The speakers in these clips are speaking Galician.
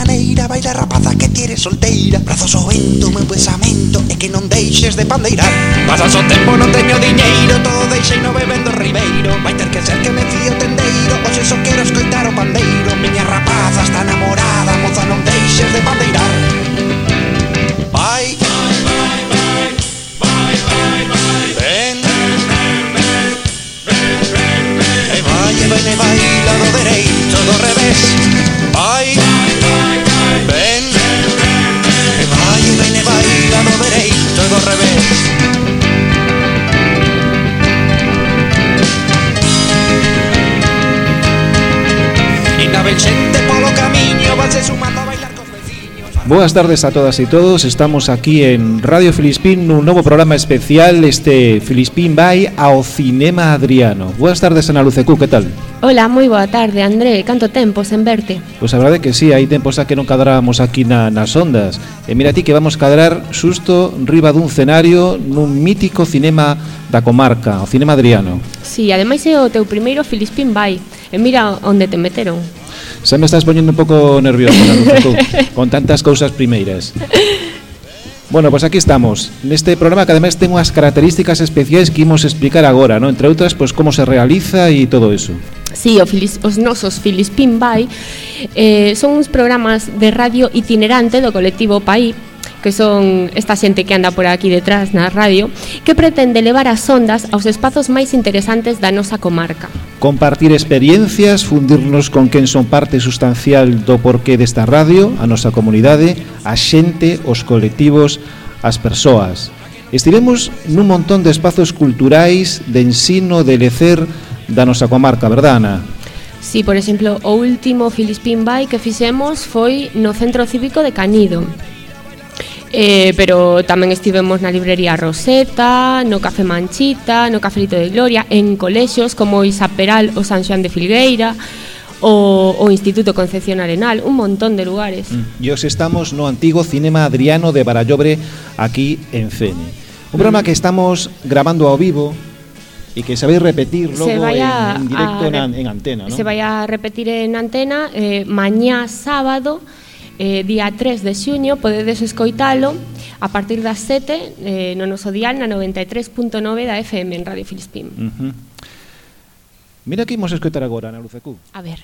maneira, baila rapaza que ti eres solteira. Brazos ao vento, meu pensamento é que non deixes de pandeirar. Pasas o tempo, non teño diñeiro, todo deixei no bebendo ribeiro. Vai ter que ser que me fío tendeiro, hoxe só quero escoitar o pandeiro. Miña rapaza está namorada, moza non deixes de pandeirar. Vai, vai, vai, vai, vai, vai, vai. Ven, e vai, e ven, e vai, lado dereito, do revés. Vai, ven, e vai, e ven, e vai, lado dereito, do revés. E na ven xente polo camiño, vanse sumando a bailar cos veciños. Boas tardes a todas e todos. Estamos aquí en Radio Filispín nun novo programa especial. Filispín vai ao Cinema Adriano. Boas tardes, Ana Lucecú, que tal? Hola, moi boa tarde, André. Canto tempo sen verte? Pois a verdade que sí, hai tempos a que non cadrábamos aquí nas ondas. E mira ti que vamos cadrar xusto riba dun cenario nun mítico cinema da comarca, o Cinema Adriano. Sí, ademais é o teu primeiro Filispín vai. E mira onde te meteron. Xa me estás poñendo un pouco nervioso, Ana Lucecú, con tantas cousas primeiras. Bueno, pois aquí estamos, neste programa que ademais ten unhas características especiais que imos explicar agora, ¿no? Entre outras, pois como se realiza e todo eso. Sí, os nosos Filispín vai son uns programas de radio itinerante do colectivo PAI, que son esta xente que anda por aquí detrás na radio, que pretende levar as ondas aos espazos máis interesantes da nosa comarca. Compartir experiencias, fundirnos con quen son parte sustancial do porqué desta radio, a nosa comunidade, a xente, os colectivos, as persoas. Estivemos nun montón de espazos culturais, de ensino, de lecer da nosa comarca, verdad, Ana? Sí, por exemplo, o último Filispín vai que fixemos foi no Centro Cívico de Canido. Pero tamén estivemos na librería Roseta, no Café Manchita, no Cafelito de Gloria, en colexios como Isaperal ou San Xoán de Filgueira, o Instituto Concepción Arenal, un montón de lugares. E hoxe estamos no antigo Cinema Adriano de Barallobre, aquí en Fene. Un programa que estamos grabando ao vivo e que se vai repetir logo en directo en antena, ¿no? Se vai a repetir en antena mañá sábado, día 3 de xuño. Podedes escoitalo a partir das 7 no noso dial na 93.9 da FM en Radio Filispín. Mira que imos escoitar agora, Ana Lucecú. A ver.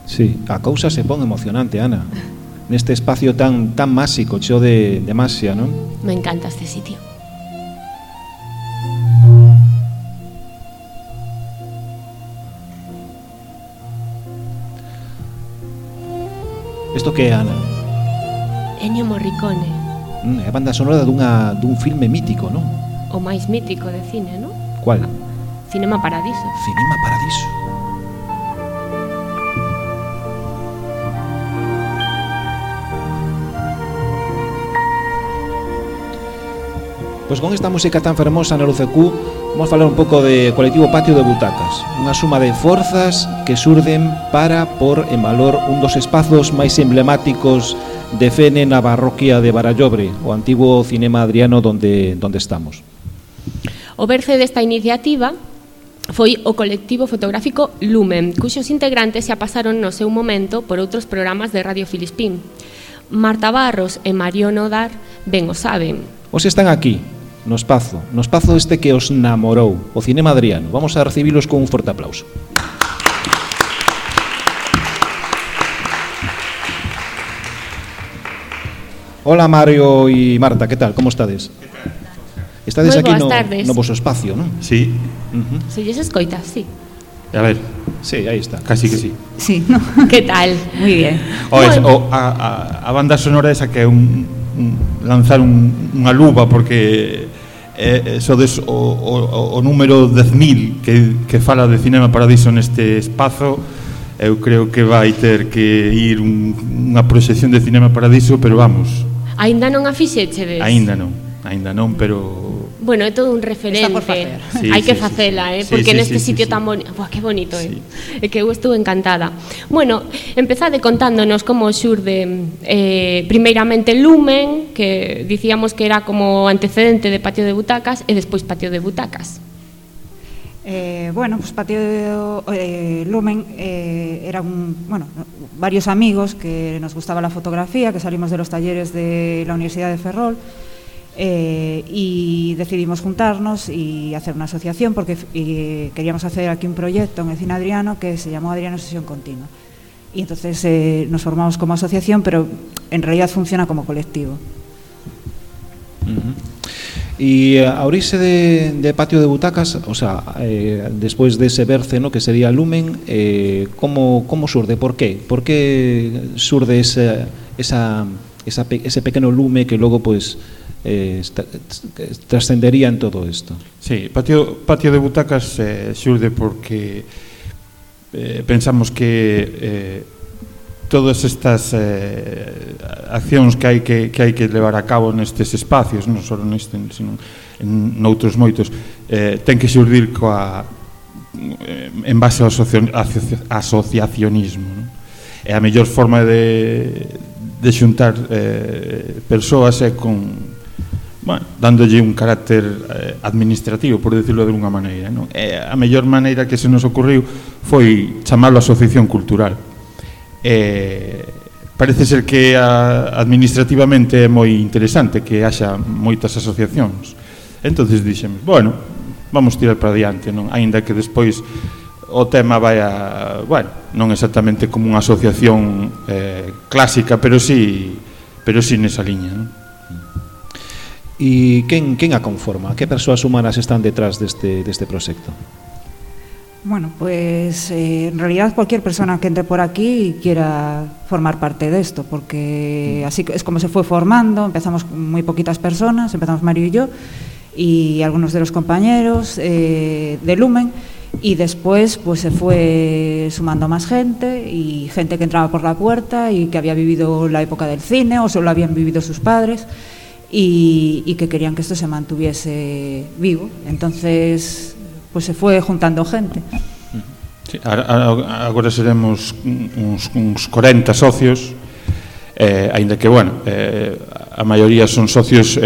Sí, a cousa se pon emocionante, Ana. Neste espacio tan máxico, cheo de masia, non? Me encanta este sitio. Isto que é, Ana? Ennio Morricone. É a banda sonora dun filme mítico, non? O máis mítico de cine, non? Cual? Cinema Paradiso. Cinema Paradiso. Pois con esta música tan fermosa, Ana Lucecú, vamos falar un pouco de colectivo Patio de Butacas, unha suma de forzas que surden para por en valor un dos espazos máis emblemáticos de Fene na parroquia de Barallobre, o antigo Cinema Adriano donde estamos. O berce desta iniciativa foi o colectivo fotográfico Lumen, cuxos integrantes xa pasaron no seu momento por outros programas de Radio Filispín. Marta Barros e Mario Nodar ben o saben. Os están aquí, no espazo este que os namorou, o Cinema Adriano. Vamos a recibilos con un forte aplauso. Hola Mario e Marta, que tal? Como estades? Estades aquí no vosso espacio, non? Sí. Se lles escoitas, sí. A ver. Sí, aí está. Casi que sí. Sí, no. Que tal? Muy bien. A banda sonora esa que é lanzar unha luva porque sodes o número 10.000 que fala de Cinema Paradiso neste espazo. Eu creo que vai ter que ir unha proxección de Cinema Paradiso, pero vamos. Aínda non a fixechedes? Aínda non, pero... Bueno, é todo un referente. Está por facer. Sí, hai que facela, porque neste sitio tan bonito. Buah, que bonito, É que eu estou encantada. Bueno, empezade contándonos como xurde primeiramente Lumen, que dicíamos que era como antecedente de Patio de Butacas, e despois Patio de Butacas. Bueno, pues Patio Lumen eran varios amigos que nos gustaba la fotografía, que salimos de los talleres de la Universidad de Ferrol y decidimos juntarnos y hacer una asociación porque queríamos hacer aquí un proyecto en el Cine Adriano que se llamó Adriano Sesión Continua. Y entonces nos formamos como asociación, pero en realidad funciona como colectivo. Y a orixe de Patio de Butacas, o sea, despois dese berce, ¿no?, que sería Lumen, como surde? Por qué? Por que surde ese pequeno lume que logo pues trascendería en todo isto? Sí, Patio de Butacas surde porque pensamos que todas estas accións que hai que levar a cabo nestes espacios, non só neste, sino en noutros moitos, ten que xurdir en base ao asociacionismo, non? E a mellor forma de xuntar persoas é dándolle un carácter administrativo, por decirlo de alguna maneira, non? E a mellor maneira que se nos ocurriu foi chamarlo asociación cultural. Parece ser que administrativamente é moi interesante que haxa moitas asociacións. Entonces dixemos, bueno, vamos tirar para diante, non? Aínda que despois o tema vai non exactamente como unha asociación clásica, pero sí nesa liña, non? E quen a conforma? Que persoas humanas están detrás deste proxecto? Bueno, pues en realidad cualquier persona que entre por aquí quiera formar parte de esto, porque así es como se fue formando. Empezamos con muy poquitas personas, empezamos Mario y yo y algunos de los compañeros de Lumen, y después pues se fue sumando más gente, y gente que entraba por la puerta y que había vivido la época del cine o solo habían vivido sus padres y que querían que esto se mantuviese vivo. Entonces pues se fue juntando gente. Sí, agora seremos uns 40 socios, aínda que, a maioría son socios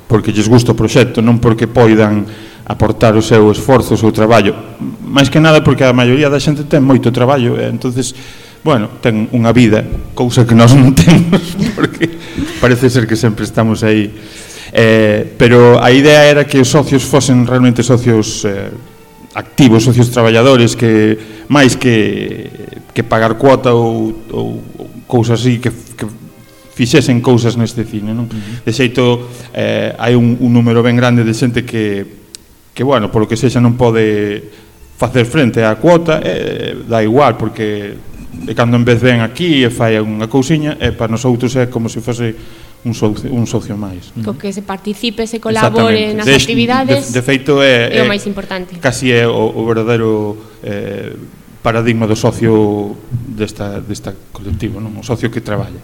porque lles gusta o proxecto, non porque poidan aportar o seu esforzo, o seu traballo, máis que nada porque a maioría da xente ten moito traballo, entonces, ten unha vida, cousa que nós non temos, porque parece ser que sempre estamos aí. Pero a idea era que os socios fosen realmente socios activos, socios traballadores, que máis que pagar cuota ou cousas así, que fixesen cousas neste cine, non? De xeito, hai un número ben grande de xente que polo que sexa non pode facer frente á cuota, dá igual, porque cando en vez ven aquí e fai unha cousiña, para nosotros é como se fose un socio máis. Co que se participe, se colabore nas actividades, de feito é o máis importante. Casi é o verdadeiro paradigma do socio desta colectivo, non? O socio que traballa.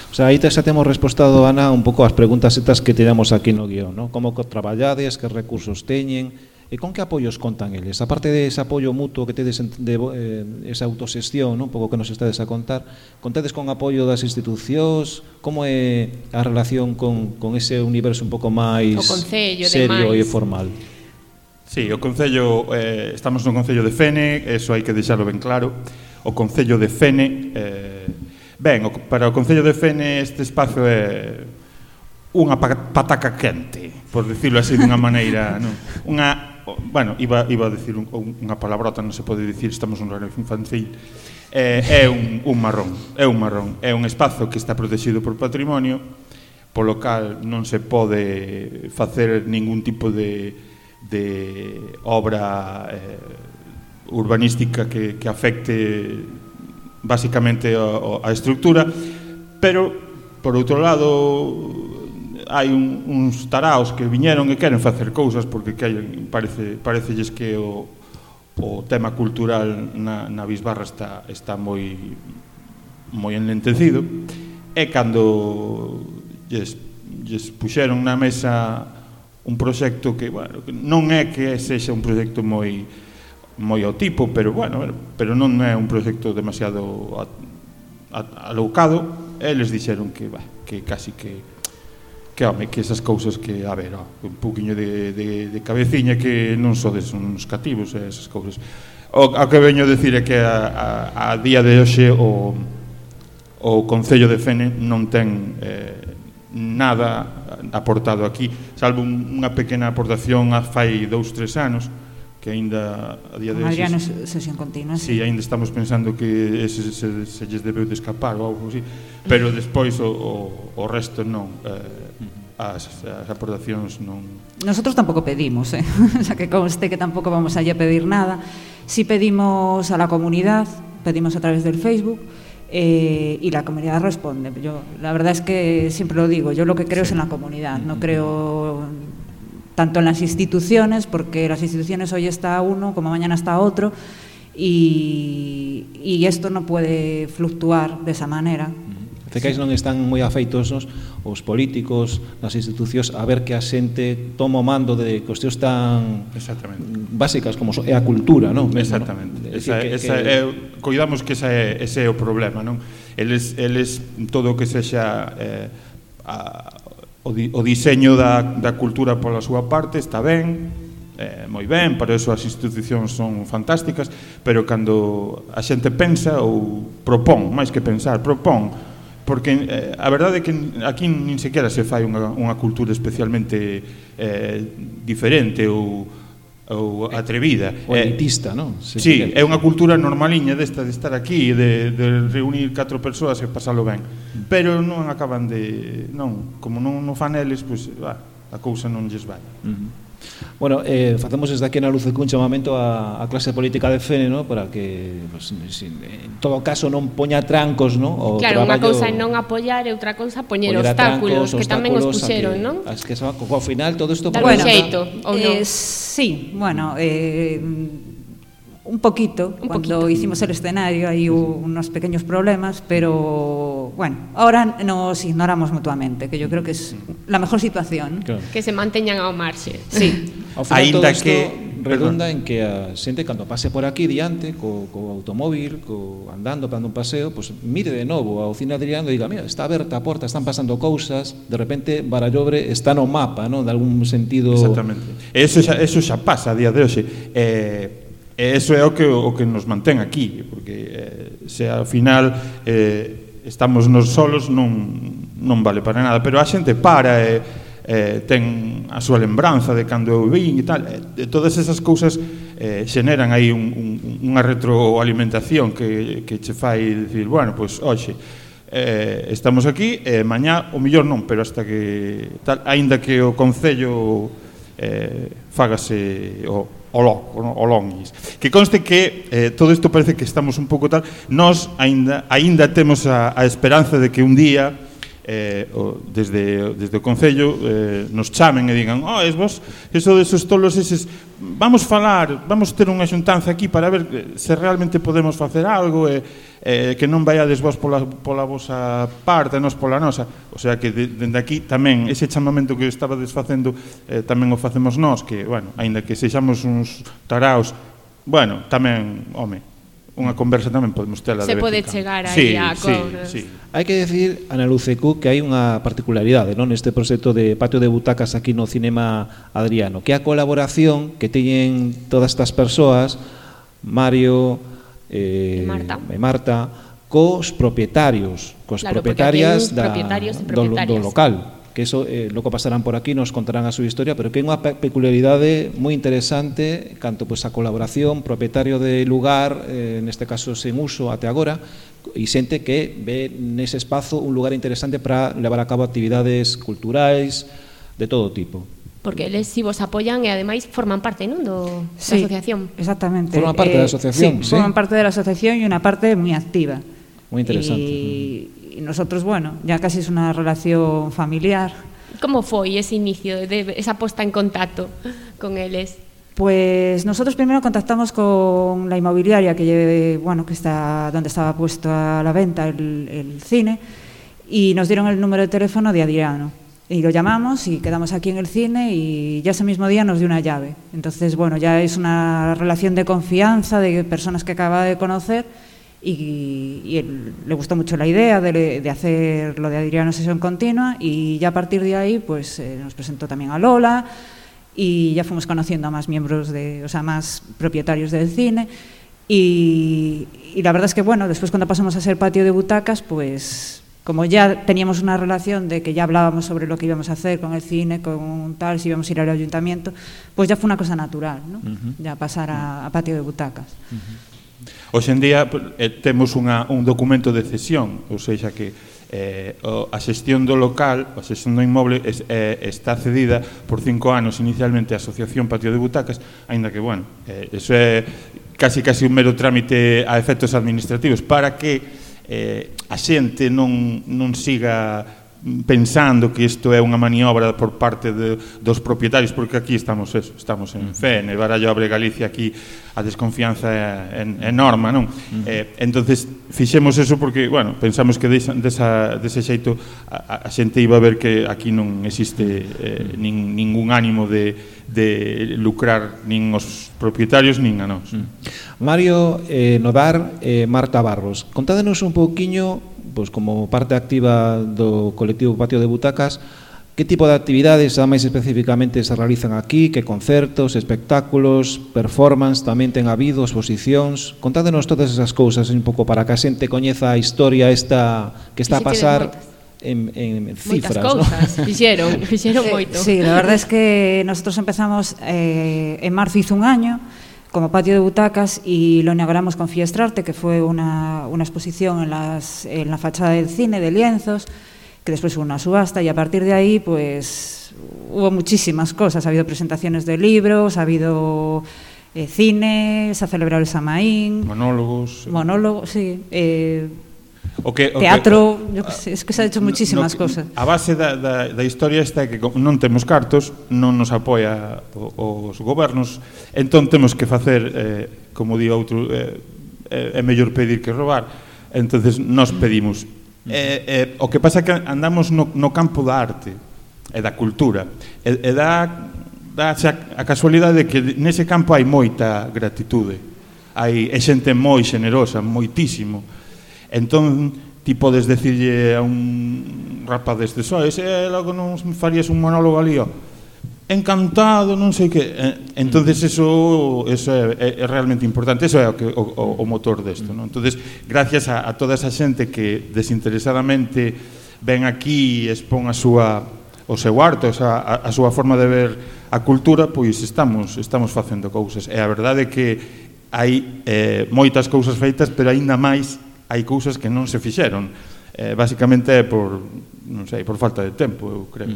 O sea, aí xa temos respostado, Ana, un pouco as preguntas estas que tiramos aquí no guión, non? Como traballades, que recursos teñen, e con que apoios contan eles? A parte de ese apoio mutuo que tedes esa autoxestión, non? Un pouco que nos estades a contar, contades con apoio das institucións? Como é a relación con ese universo un pouco máis serio e formal? Sí, o Concello, estamos no Concello de Fene, eso hai que deixarlo ben claro. O Concello de Fene, para o Concello de Fene este espazo é unha pataca quente, por decirlo así dunha maneira, non? Iba a decir unha palabrota, non se pode dicir, estamos nun horario infantil. É un marrón, é un espazo que está protegido por patrimonio, polo cal non se pode facer ningún tipo de obra urbanística que afecte basicamente a estructura, pero por outro lado hai uns taraos que viñeron e queren facer cousas porque parecelles que o tema cultural na Bisbarra está moi enlentecido, e cando lles puxeron na mesa un proxecto que non é que sexa un proxecto moi ao tipo, pero non é un proxecto demasiado alocado, eles dixeron que casi que home, que esas cousas que, a ver, un pouquiño de cabeciña, que non sodes uns cativos, esas cousas. O que veño a decir é que a día de hoxe o Concello de Fene non ten nada aportado aquí, salvo unha pequena aportación fai 2-3 anos, que aínda a día de hoxe... Adriano, sesión continua. Sí, aínda estamos pensando que se lles debeu de escapar ou algo así, pero despois o resto non, as aportacións non... Nosotros tampouco pedimos, o sea, que conste que tampouco vamos allí a pedir nada. Si pedimos a la comunidad, pedimos a través del Facebook, y la comunidad responde. La verdad es que siempre lo digo, yo lo que creo es en la comunidad, no creo tanto en las instituciones, porque las instituciones hoy está uno como mañana está otro, y esto no puede fluctuar de esa manera. Cecais non están moi afeitos os políticos, as institucións, a ver que a xente toma o mando de cuestións tan básicas como é a cultura, non? Exactamente. Coidamos que ese é o problema, non? Eles todo o que sexa o diseño da cultura pola súa parte está ben, moi ben, para eso as institucións son fantásticas, pero cando a xente pensa ou propón, máis que pensar, propón, porque a verdade é que aquí nin sequera se fai unha cultura especialmente diferente ou atrevida. O elitista, non? Sí, é unha cultura normaliña desta de estar aquí, de reunir 4 persoas e pasalo ben, pero non acaban de... non, como non fan eles, pois a cousa non lles vai. Bueno, facemos desde aquí na Lucecu un chamamento a clase política de Fene, ¿no? Para que, pues, en todo caso, non poña trancos, ¿no? Claro, unha cousa é non apoiar e outra cousa poñer obstáculos, que tamén os puxeron, non? Es que ao final todo isto... Dar un xeito, ou non? Sí, bueno... un poquito, cuando hicimos el escenario hay unos pequeños problemas, pero bueno, ahora nos ignoramos mutuamente, que yo creo que es la mejor situación. Claro. Que se manteñan ao marxe. Sí. Ao final todo isto redunda en que a xente cando pase por aquí diante co automóvil, andando, dando un paseo, pues mire de novo ao cine Adriano e diga, mira, está aberta a porta, están pasando cousas, de repente Barallobre está no mapa, ¿no? De algún sentido. Exactamente. Eso xa pasa a día de hoxe. Eso é o que nos mantén aquí, porque se ao final estamos nos solos non vale para nada, pero a xente para ten a súa lembranza de cando eu vin e tal, todas esas cousas xeneran aí unha retroalimentación que che fai dicir, bueno, pois hoxe estamos aquí, mañá o millor non, pero hasta que tal, aínda que o Concello fágase o longuis. Que conste que todo isto parece que estamos un pouco tal, nós aínda temos a esperanza de que un día desde o Concello nos chamen e digan, es vos, eso desos tolos eses, vamos ter unha xuntanza aquí para ver se realmente podemos facer algo que non vaiades vos pola vosa parte, nós pola nosa. O sea que dende aquí tamén ese chamamento que estabades facendo tamén o facemos nós, que, bueno, aínda que sexamos uns taraos, bueno, tamén, home, unha conversa tamén podemos tela de vez en cando. Se pode chegar aí a acordos. Sí. Hai que decir, Ana Lucecu, que hai unha particularidade, non, neste proxecto de patio de butacas aquí no Cinema Adriano, que a colaboración que teñen todas estas persoas, Mario e Marta, cos propietarios, cos propietarias do local, que eso logo pasarán por aquí, nos contarán a súa historia, pero que é unha peculiaridade moi interesante canto pois a colaboración, propietario de lugar, neste caso sen uso até agora, e xente que ve nese espazo un lugar interesante para levar a cabo actividades culturais de todo tipo. Porque eles si vos apoian e ademais forman parte, non, da asociación. Exactamente. Forman parte da asociación, sí. Forman parte da asociación e unha parte moi activa. Moi interesante. Y nosotros, bueno, ya casi es una relación familiar. ¿Cómo foi ese inicio, esa puesta en contacto con eles? Pues nosotros primero contactamos con la inmobiliaria que está donde estaba puesto a la venta el cine, y nos dieron el número de teléfono de Adriano. Y lo llamamos y quedamos aquí en el cine, y ya ese mismo día nos dio una llave. Entonces, bueno, ya es una relación de confianza, de personas que acaba de conocer, y él, le gustó mucho la idea de hacer lo de Adriano Sesión Continua, y ya a partir de ahí pues nos presentó también a Lola, y ya fuimos conociendo a más miembros más propietarios del cine, y la verdad es que bueno, después cuando pasamos a ser Patio de Butacas, pues como ya teníamos una relación de que ya hablábamos sobre lo que íbamos a hacer con el cine, con tal, si íbamos a ir al ayuntamiento, pues ya fue una cosa natural, ¿no? Ya pasar a Patio de Butacas. Hoxe en día temos un documento de cesión, ou seja que a xestión do local, a xestión do inmoble está cedida por 5 anos inicialmente a Asociación Patio de Butacas, aínda que, bueno, eso é casi un mero trámite a efectos administrativos para que a xente non siga pensando que isto é unha maniobra por parte dos propietarios, porque aquí estamos en Fene, Barallo Abre Galicia, aquí a desconfianza é enorme, non? Entonces fixemos eso porque, bueno, pensamos que dese xeito a xente iba a ver que aquí non existe ningún ánimo de lucrar nin os propietarios nin a nós. Mario Nodar e Marta Barros, contádenos un pouquiño, pois como parte activa do colectivo Patio de Butacas, que tipo de actividades máis especificamente se realizan aquí, que concertos, espectáculos, performance tamén ten habido, exposicións? Contádenos todas esas cousas un pouco para que a xente coñeza a historia esta que está a pasar en cifras, ¿no? Moitas cousas, fixeron moito. Sí, la verdad es que nosotros empezamos en marzo, hizo un año, como Patio de Butacas, y lo inauguramos con Fiestrarte, que fue una exposición en la fachada del cine de lienzos, que después hubo una subasta, y a partir de ahí pues hubo muchísimas cosas. Ha habido presentaciones de libros, ha habido cine, se ha celebrado el Samaín, monólogos, sí, teatro, es que se ha hecho muchísimas cosas. A base da historia está que non temos cartos, non nos apoia os gobernos, entón temos que facer, como di outro, é mellor pedir que robar, entonces nos pedimos. O que pasa é que andamos no campo da arte e da cultura, e dá a casualidade de que nese campo hai moita gratitude, hai xente moi xenerosa, moitísimo. Entón, ti podes decirlle a un rapaz deste logo non farías un monólogo ali, encantado, non sei que. Entonces eso é realmente importante, eso é o motor desto, non? Entonces, gracias a toda esa xente que desinteresadamente ven aquí e expón o seu arte, a súa forma de ver a cultura, pois estamos facendo cousas. E a verdade é que hai moitas cousas feitas, pero aínda máis hai cousas que non se fixeron. Básicamente é por falta de tempo, eu creo.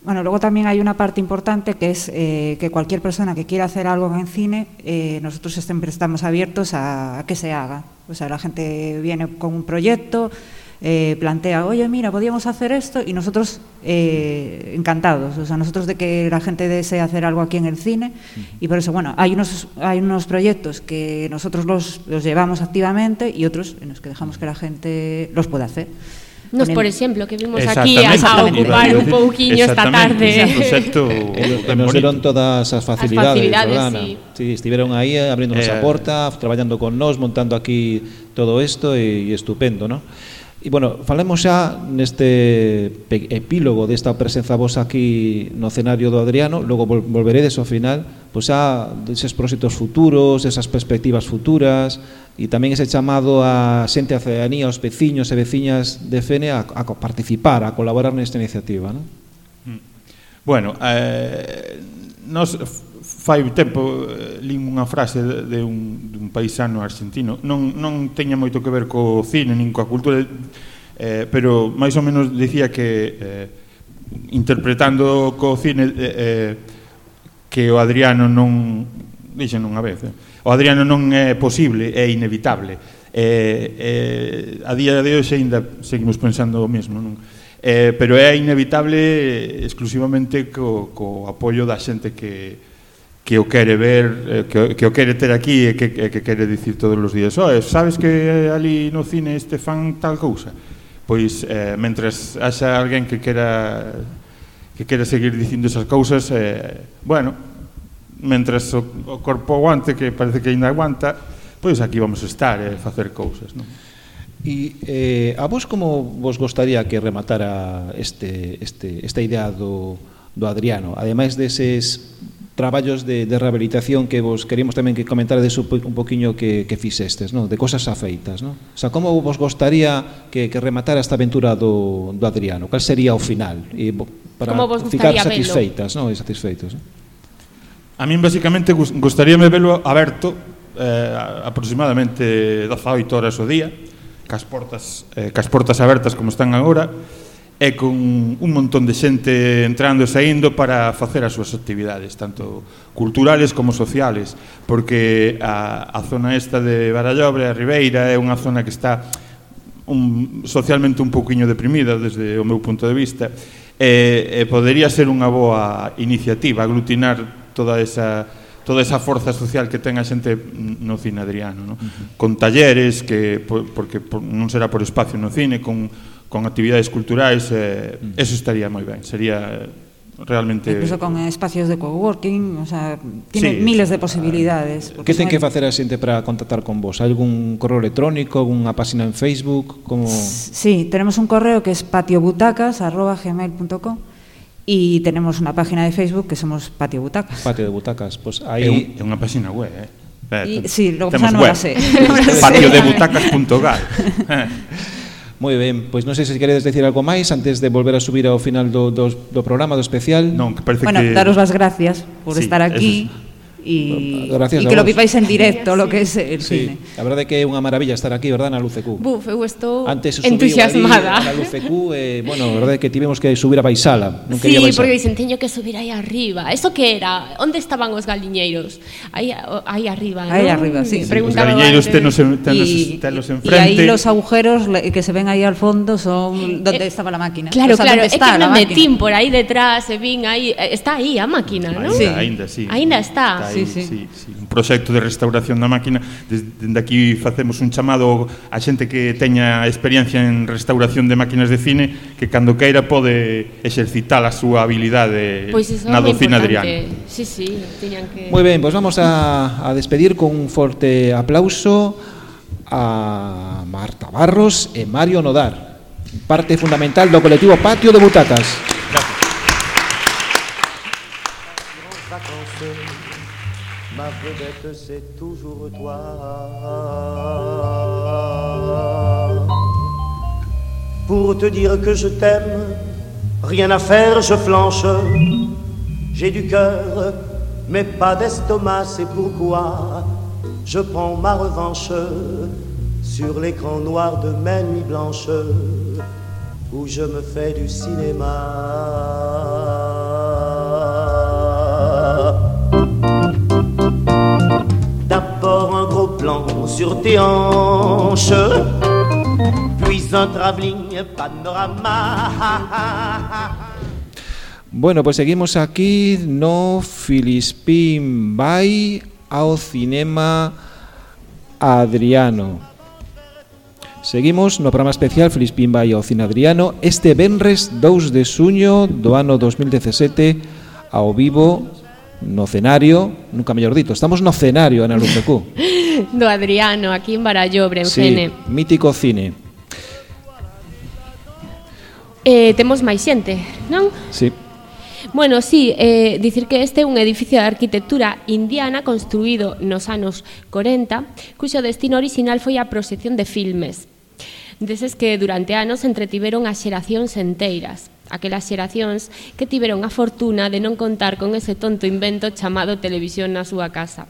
Bueno, luego también hay una parte importante que es que cualquier persona que quiera hacer algo en cine, nosotros siempre estamos abiertos a que se haga. O sea, la gente viene con un proyecto, plantea, oye, mira, podíamos hacer esto, y nosotros encantados, o sea, nosotros de que la gente desee hacer algo aquí en el cine, y por eso, bueno, hay unos proyectos que nosotros los llevamos activamente y otros en los que dejamos que la gente los pueda hacer. Nos, por exemplo, que vimos aquí a ocupar un pouquiño esta tarde. Nos deron todas as facilidades, sí. Sí, estiveron aí abriéndonos a porta, traballando con nós, montando aquí todo isto, e estupendo, ¿no? E, bueno, falemos xa neste epílogo desta presenza vosa aquí no escenario do Adriano, logo volveredes ao final, pois xa deses proxectos futuros, esas perspectivas futuras, e tamén ese chamado a xente, a ciudadanía, aos veciños e veciñas de Fene a participar, a colaborar nesta iniciativa, non? Bueno, nos fai tempo lín unha frase de un paisano argentino, non teña moito que ver co cine nin coa cultura, pero máis ou menos dicía que interpretando co cine que o Adriano non, dixen unha vez, o Adriano non é posible, é inevitable. A día de hoxe ainda seguimos pensando o mesmo, non? Pero é inevitable exclusivamente co apoio da xente que o quere ver, que o quere ter aquí e que quere dicir todos os días, sabes que ali no cine este fan tal cousa? Pois, mentres haxa alguén que quera seguir dicindo esas cousas, bueno, mentres o corpo aguante, que parece que ainda aguanta, pois aquí vamos a estar e facer cousas, non? E a vos como vos gostaría que rematara esta idea do Adriano, ademais deses traballos de rehabilitación que vos queríamos tamén que comentarades un poquinho que fixestes, non? De cosas afeitas, non? O sea, como vos gostaría que rematara esta aventura do Adriano? Cal sería o final? E para ficar satisfeitas, non? E satisfeitos, non? A min basicamente gustaríame velo aberto aproximadamente 18 horas ao día, cas portas abertas como están agora, e con un montón de xente entrando e saindo para facer as súas actividades, tanto culturales como sociales, porque a zona esta de Barallobre, a Ribeira, é unha zona que está socialmente un pouquiño deprimida desde o meu punto de vista, e podería ser unha boa iniciativa aglutinar toda esa forza social que ten a xente no Cine Adriano, no? Con talleres, porque non será por espacio no cine, con actividades culturais, eso estaría moi ben, sería realmente... Incluso con espacios de coworking, o sea, tiene miles de posibilidades. Que ten que facer a xente para contactar con vos? Hai algún correo electrónico, algunha página en Facebook? Como... Sí, tenemos un correo que es patiobutacas@gmail.com y tenemos una página de Facebook que somos Patio Butacas. Patio de Butacas, pues ahí... É unha página web, Sí, lo que pasa non la sé. Patiodebutacas.gal. Moi ben, pois non sei se queredes decir algo máis antes de volver a subir ao final do programa, do especial. Non, que parece bueno, que... daros las gracias por estar aquí y que lo vivais en directo, lo que es el cine. A verdade é que é unha maravilla estar aquí, verdad, na LUCQ. Buf, eu estou entusiasmada. Na LUCQ, bueno, a verdade é que tivemos que subir a baixala. Non quería baixar. Sí, porque dicen, teño que subir aí arriba. Eso que era? Onde estaban os galiñeiros? Aí arriba, ¿no? Ahí arriba, sí. Os galiñeiros telos enfrente. Y aí los agujeros que se ven aí al fondo son donde estaba la máquina. Claro, claro, é que me metín por aí detrás e vin aí, está aí a máquina, ¿no? Ainda, sí. Ainda está. Sí. Un proxecto de restauración da máquina. Desde aquí facemos un chamado a xente que teña experiencia en restauración de máquinas de cine, que cando queira pode exercitar a súa habilidade na do Cine Adriano. Sí, tiñan que... Moi ben, pois vamos a despedir con un forte aplauso a Marta Barros e Mario Nodar, parte fundamental do colectivo Patio de Butacas. Ma vedette, c'est toujours toi. Pour te dire que je t'aime, rien à faire, je flanche. J'ai du cœur, mais pas d'estomac, c'est pourquoi je prends ma revanche sur l'écran noir de mes nuits blanches où je me fais du cinéma. D'abord un gros plan sur tes hanches, puis un travelling panorama. Bueno, pues seguimos aquí no Filispín vai ao Cinema Adriano. Seguimos no programa especial Filispín vai ao Cine Adriano este venres 2 de xuño do ano 2017 ao vivo no cenario, nunca mellor dito, estamos no cenario na LUCQ. Do Adriano, aquí en Barallobre, en Fene. Mítico cine. Temos máis xente, non? Sí. Bueno, sí, dicir que este é un edificio de arquitectura indiana construído nos anos 40, cuxo destino original foi a proxección de filmes, deses que durante anos entretiveron as xeracións enteiras, aquelas xeracións que tiveron a fortuna de non contar con ese tonto invento chamado televisión na súa casa.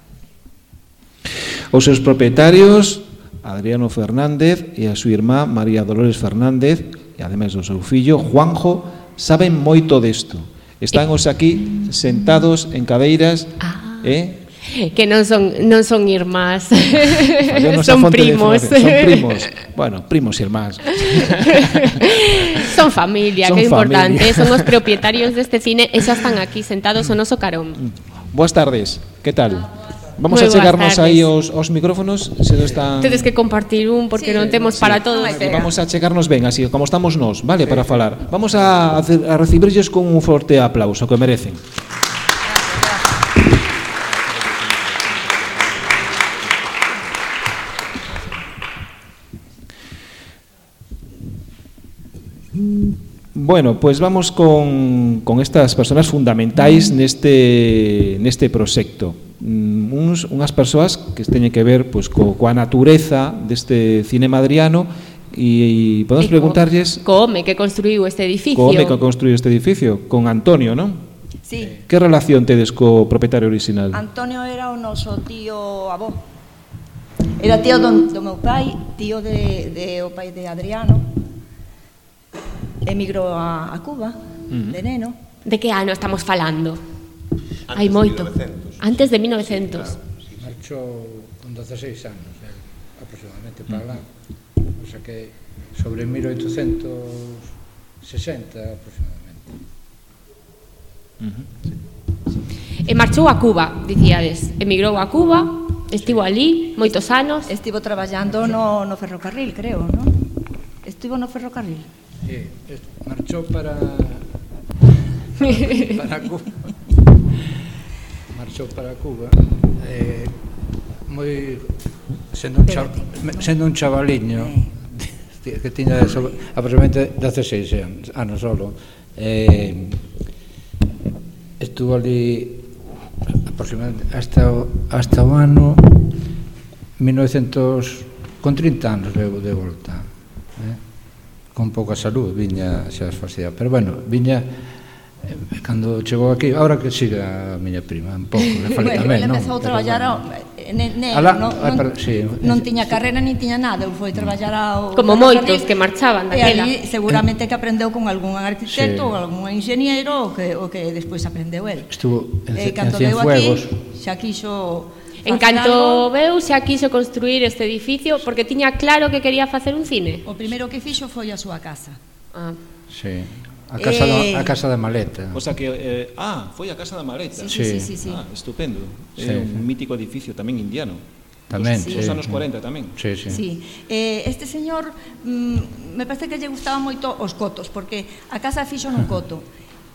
Os seus propietarios, Adriano Fernández e a súa irmá María Dolores Fernández, e ademais do seu fillo Juanjo, saben moito desto. Están os aquí sentados en cadeiras, que non son irmás. Son primos. Son primos. Bueno, primos e irmás. Son familia, que é importante. Son os propietarios deste cine e xa están aquí sentados o noso carón. Boas tardes, que tal? Vamos a chegarnos aí os micrófonos, se non están... Tedes que compartir un porque non temos para todos. Vamos a chegarnos ben, así como estamos nós, vale, para falar. Vamos a recibirlles con un forte aplauso que merecen. Bueno, pues vamos con estas persoas fundamentais neste proxecto. Unhas persoas que teñen que ver pois, coa natureza deste cinema adriano e podemos preguntarlles... Co home que construiu este edificio. Co home que construiu este edificio, con Antonio, non? Sí. Que relación tedes co propietario original? Antonio era o noso tío avó. Era tío do meu pai, tío de o pai de Adriano. Emigrou a Cuba, de neno. De que ano estamos falando? Hai moito. Antes de 1900. Marchou con 16 anos, aproximadamente para lá. O sea que sobre 1860 aproximadamente. E marchou a Cuba, dicíades. Emigrou a Cuba, estivo ali moitos anos. Estivo traballando no ferrocarril, creo, non? Estivo no ferrocarril. Marchou para Cuba. Marchou para Cuba. Moi sendo un chavaliño que tiña aproximadamente 16 anos solo. Estuvo ali aproximadamente hasta o ano 1900, con 30 anos de volta, con pouca salud, viña xa fastidiado, pero bueno, viña cando chegou aquí, ahora que siga a miña prima un pouco, le falei tamén, non? Empezou a traballar non tiña carreira nin tiña nada, foi traballar ao como moitos que marchaban daquela. E ali seguramente que aprendeu con algún arquitecto ou algún enxeñeiro o que despois aprendeu el. Estuvo en Cienfuegos. Xa quixo En canto veu, xa quiso construir este edificio porque tiña claro que quería facer un cine. O primeiro que fixo foi a súa casa. Sí. A casa da Maleta. O sea que foi a casa da Maleta. Sí. Estupendo. É un mítico edificio tamén indiano. Tamén, dos anos 40 tamén. Sí. Este señor me parece que lle gustaba moito os cotos, porque a casa fixo nun coto.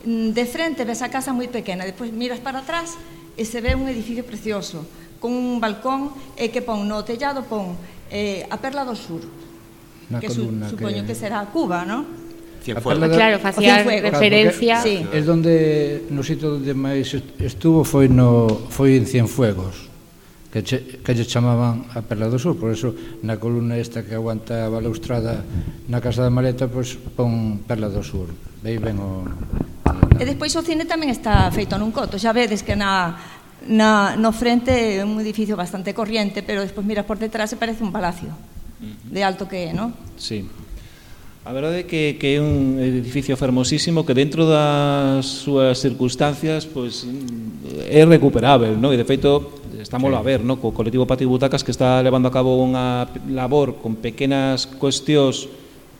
De frente ves a casa moi pequena, despois miras para atrás e se ve un edificio precioso, con un balcón que pon no tellado a Perla do Sur, que supoño que será Cuba, non? Claro, facía referencia. É donde, no sitio onde máis estuvo foi en Cienfuegos, que lle chamaban a Perla do Sur, por eso na columna esta que aguanta a balaustrada na casa da Maleta, pois pon Perla do Sur. Vei ben o... E despois o cine tamén está feito nun coto, xa vedes que no frente é un edificio bastante corriente, pero despois miras por detrás e parece un palacio de alto que é, non? Sí. A verdade é que é un edificio fermosísimo que dentro das súas circunstancias pois é recuperável, non? E de feito estámoslo a ver, non? Co colectivo Patio Butacas que está levando a cabo unha labor con pequenas cuestións,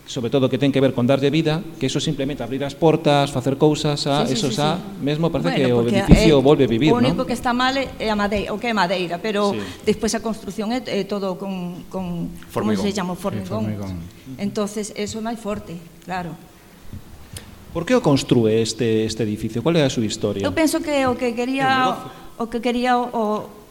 sobre todo que ten que ver con darlle vida, que eso simplemente abrir as portas, facer cousas, eso xa mesmo parece que o edificio volve a vivir, non? O único que está mal é a madeira, o que é madeira, pero despois a construción é todo con como se chama, formigón. Entonces, eso é máis forte, claro. Por que o construe este edificio? Qual é a súa historia? Eu penso que o que quería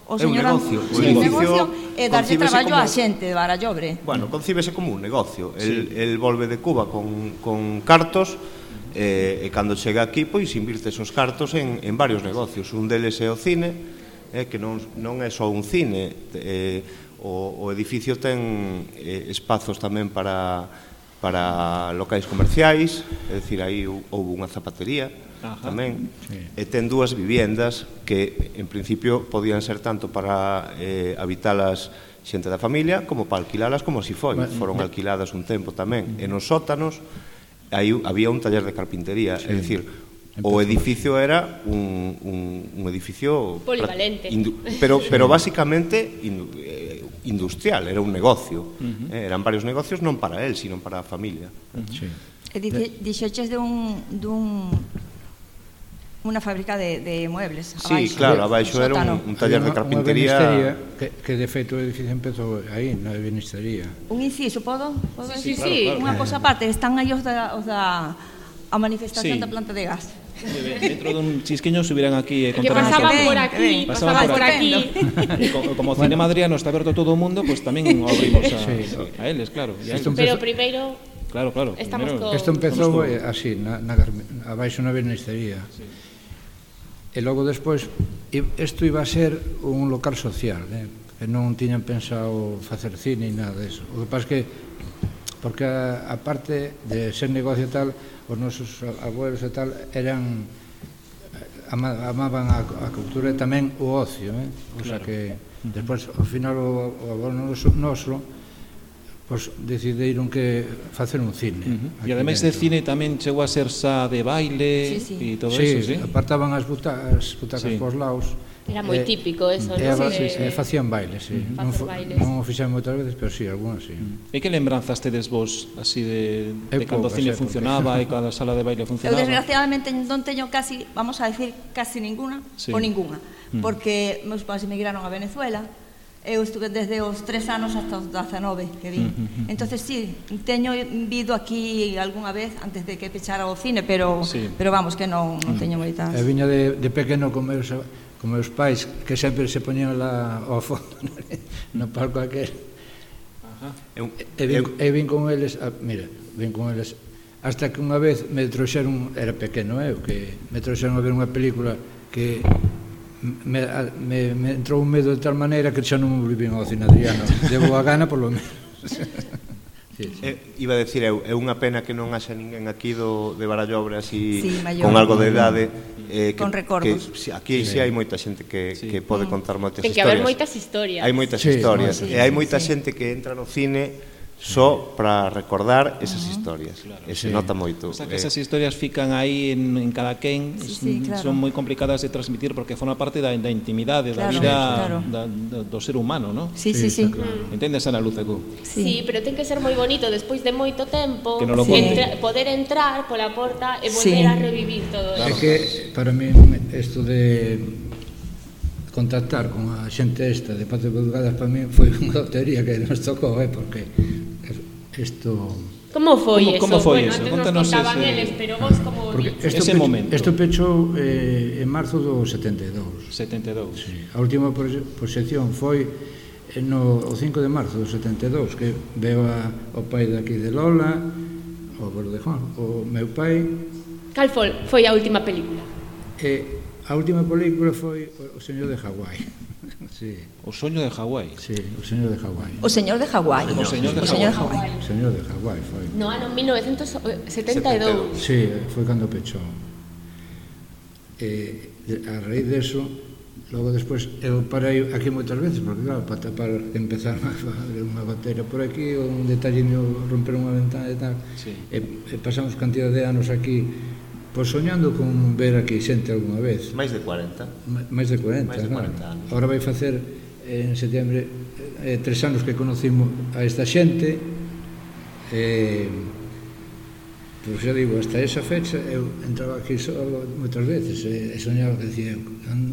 o señor negocio. O negocio é darlle traballo á xente de Barallobre. Bueno, concíbese como un negocio. El volve de Cuba con cartos e cando chega aquí, pois invirte esos cartos en varios negocios. Un deles é o cine, que non é só un cine. O edificio ten espazos tamén para locais comerciais, é dicir, aí houve unha zapatería tamén, e ten dúas viviendas que en principio podían ser tanto para habitalas xente da familia como para alquilalas, como si foron alquiladas un tempo tamén. E nos sótanos aí había un taller de carpintería, é dicir, o edificio era un edificio polivalente, pero basicamente industrial, era un negocio. Eran varios negocios non para él, sino para a familia. E dixeches de unha fábrica de muebles. Sí, claro, abaixo era un taller de carpintería. Que de feito o edificio empezou aí, na ebenistería. Un inciso, podo? Sí. Unha cosa aparte, están aí os da a manifestación da planta de gas. Dentro dun chisquiño subirán aquí e que pasaban por aquí. Como o cinema adriano está aberto a todo o mundo, pois tamén o abrimos a eles, claro. Pero primeiro Claro. Estamos Primeiro, co- Isto empezou así, abaixo na vernistería. E logo despois, isto iba a ser un local social, que non tiñan pensado facer cine e nada disso. O que pasa que, porque a parte de ser negocio e tal, os nosos abuelos e tal eran amaban a cultura e tamén o ocio, o sea que despois ao final o abuelo noso pois decidiron que facer un cine. E ademais de cine tamén chegou a ser xa de baile e todo sí, eso, sí? apartaban as butacas pos lados. Era moi típico eso, non? Facían bailes, sí. Non o fixeron moitas veces, pero sí, algunhas sí. E que lembranzas tedes vos así de cando o cine funcionaba e cando a sala de baile Eu funcionaba? desgraciadamente non teño casi, vamos a decir, casi ninguna ou ninguna, porque meus pais emigraron a Venezuela. Eu estuve desde os 3 anos hasta os 19 que vim. Entonces sí, teño vido aquí algunha vez antes de que pechara o cine, pero vamos, que non teño moitas. E viña de pequeno con meus pais, que sempre se poñían lá ao fondo no palco aquel. E vin con eles, vin con eles hasta que unha vez me trouxeron, era pequeno que me trouxeron a ver unha película que me entrou un medo de tal maneira que xa non me volvín ao cine Adriano. Debo a gana por lo menos. Iba a decir é unha pena que non haxa ninguén aquí de Barallobre así con algo de idade con recordos. Aquí sí hai moita xente que pode contar moitas historias. Ten que haber moitas historias. Hai moitas historias e hai moita xente que entra no cine só para recordar esas historias. E se nota moito. O sea, que esas historias fican aí en cada quen, son moi complicadas de transmitir porque forma parte da intimidade, da vida do ser humano, non? Sí. Entendes, Ana Lucecu? Sí, pero ten que ser moi bonito despois de moito tempo poder entrar pola porta e volver a revivir todo É eso. que para mí isto de contactar con a xente esta de Patio de Bugadas para mí foi unha lotería que nos tocou, porque isto... Como foi eso? Como foi bueno, eso? Antes Contanos nos contaban eles, pero vos como ese momento. Isto pechou en marzo do 72. 72. Sí. A última proxección foi o 5 de marzo do 72, que veo o pai daqui de Lola, o abuelo de Juan, o meu pai... Cal foi a última película? A última película foi O Señor de Hawái. Sí. O soño de Hawái. Sí, O Señor de Hawái. O Señor de Hawái. O Señor de Hawái. O Señor de Hawái foi. No ano 1972. Sí, foi cando pechou. A raíz deso, logo despois, eu parei aquí moitas veces, porque claro, para tapar, empezar a fazer unha goteira por aquí, ou un detalliño, romper unha ventana e tal, e pasamos cantidad de anos aquí, pois soñando con ver aquí xente algunha vez. Máis de 40. Máis de 40, anos. Ahora vai facer en setembro 3 anos que conocimos a esta xente. Pois xa digo, hasta esa fecha eu entraba aquí solo moitas veces e soñaba que decía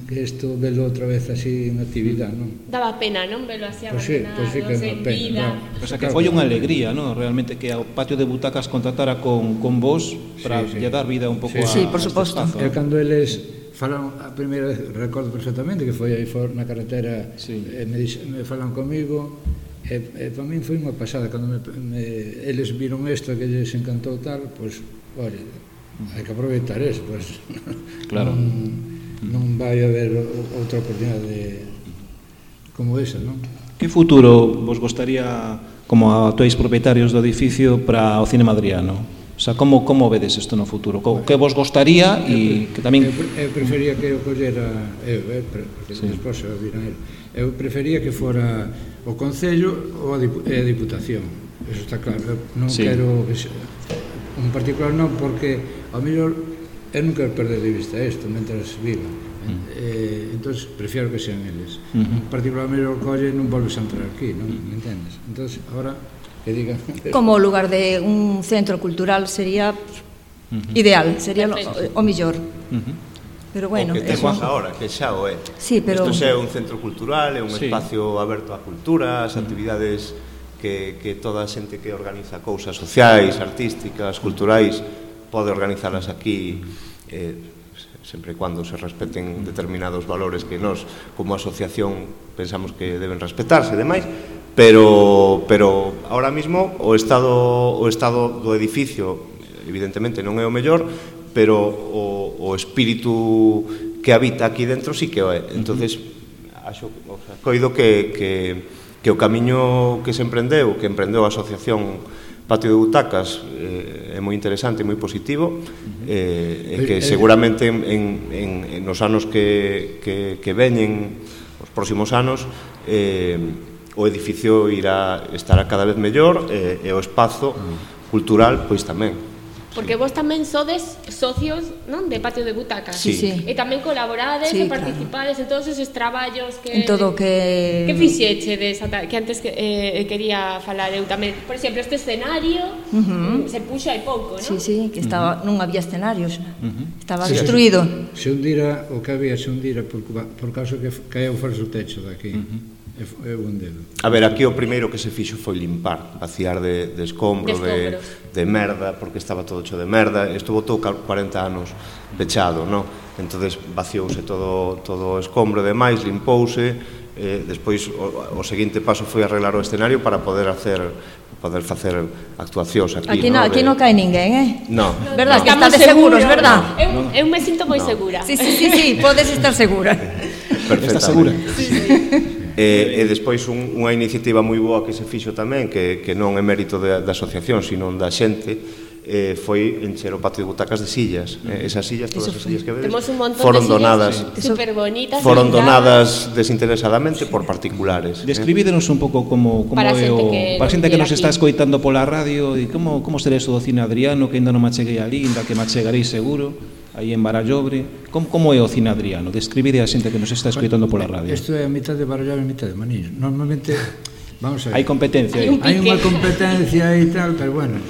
que isto velo outra vez así en actividade, non? Daba pena, non? Velo así abandonado, pues sí que sen vida. O sea, que foi unha alegría, non? Realmente que o Patio de Butacas contactara con vos para lle dar vida un pouco a por suposto. E cando eles falaron a primeira vez, recordo perfectamente que foi aí na carretera, me falan comigo. E para min foi unha pasada cando eles viron isto que lles encantou tal, pois, ora, hai que aproveitar eso, pois claro. Non vai haber outra oportunidade como esa, non? Que futuro vos gostaría como actuais propietarios do edificio para o cine madriano? O sea, como vedes isto no futuro? Que vos gostaría e que tamén... Eu prefería que o collera porque despois se viran el. Eu prefería que fora o Concello ou a Diputación. Eso está claro. Eu non quero que un particular non, porque ao mellor eu non quero perder de vista isto mentras viva. Entón, prefiero que sean eles. Un particular ao mellor colle non volves a entrar aquí, non? Me entendes? Entón, agora que digan... Como lugar de un centro cultural sería ideal, sería o mellor. Pero bueno, o que temos agora, que xa o é. Sí, pero... Isto é un centro cultural, é un espacio aberto á cultura, as actividades que toda a xente que organiza cousas sociais, artísticas, culturais, pode organizalas aquí, sempre e cando se respeten determinados valores que nós, como asociación, pensamos que deben respetarse e demais, pero ahora mismo o estado do edificio evidentemente non é o mellor, pero o espírito que habita aquí dentro sí que o é. Entonces, coido que o camiño que se emprendeu, que emprendeu a Asociación Patio de Butacas, é moi interesante e moi positivo, e que seguramente nos anos que veñen, os próximos anos, o edificio estará cada vez mellor, e o espazo cultural pois tamén. Porque vos tamén sodes socios, non, de Patio de Butacas. Sí. E tamén colaborades e participades en todos esos traballos que... En todo que... Que fixeche que antes quería falar eu tamén. Por exemplo, este escenario se puxo hai pouco, non? Sí, que estaba, non había escenarios, estaba destruído. Se hundira, o que había se hundira por causa que caeu fora o techo daqui. É un dedo. A ver, aquí o primeiro que se fixo foi limpar, vaciar de escombro, de merda, porque estaba todo hecho de merda. Estuvo todo 40 anos pechado, non? Entonces vaciouse todo o escombro e demais, limpouse. Despois o seguinte paso foi arreglar o escenario para poder facer actuacións aquí. Aquí non cae ninguén, Non. Verdad, que estades seguros, verdad? Eu me sinto moi segura. Sí, podes estar segura. Perfectamente. Estás segura? E despois unha iniciativa moi boa que se fixo tamén, que non é mérito da asociación, sino da xente, foi encher o Patio de Butacas de sillas. Esas sillas, todas as sillas que vedes, foron donadas foron donadas desinteresadamente por particulares. Describídenos un pouco como para é o... Para a xente que nos está escoitando pola radio, e como será eso do Cine Adriano, que ainda non macheguei ali, ainda que machegarei seguro, aí en Barallobre. Como é o Cine Adriano? Describide a xente que nos está escoitando pola radio. Isto é a mitad de Barallobre e a mitad de Maniño. Normalmente, vamos a ver. Hai competencia aí. Hai unha competencia e tal, pero bueno,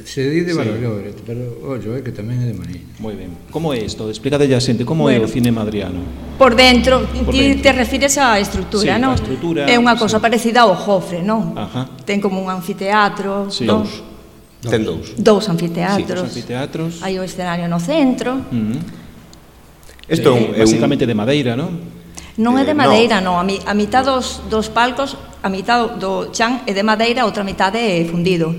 se di de Barallobre, pero ollo, que tamén é de Maniño. Moi ben. Como é isto? Explícate a xente, como é o Cine Adriano? Por dentro, ti te refires á estrutura, non? A estrutura. É unha cosa parecida ao Jofre, non? Ajá. Ten como un anfiteatro, non? Ten dous. Dous anfiteatros. Hai o escenario no centro. Isto é basicamente de madeira, non? Non é de madeira, non. A mitad dos palcos, a mitad do chan é de madeira, a outra mitad é fundido.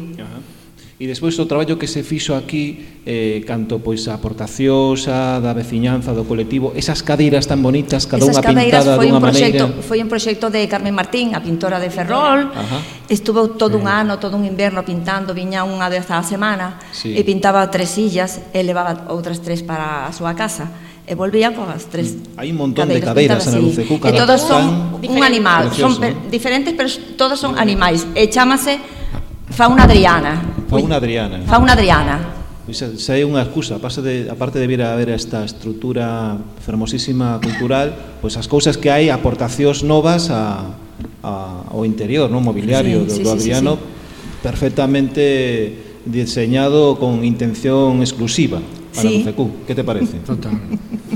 E despois o traballo que se fixo aquí, canto pois a aportacións da veciñanza, do colectivo, esas cadeiras tan bonitas, cada unha pintada dunha maneira. Foi un proxecto de Carmen Martín, a pintora de Ferrol. Estuvo todo un ano, todo un inverno pintando, viña unha vez á semana, e pintaba 3 sillas, e levaba outras 3 para a súa casa, e volvía coas 3. Hai un montón de cadeiras na Lucecu, e todas son un animal, son diferentes, pero todas son animais, e chámase Fauna Adriana. Fauna Adriana. Fauna Adriana. Pois xa é unha excusa, aparte de vir a ver esta estrutura fermosísima cultural, pois as cousas que hai, aportacións novas ao interior, no mobiliario do Adriano, perfectamente diseñado con intención exclusiva para Lucecu. Que te parece? Total.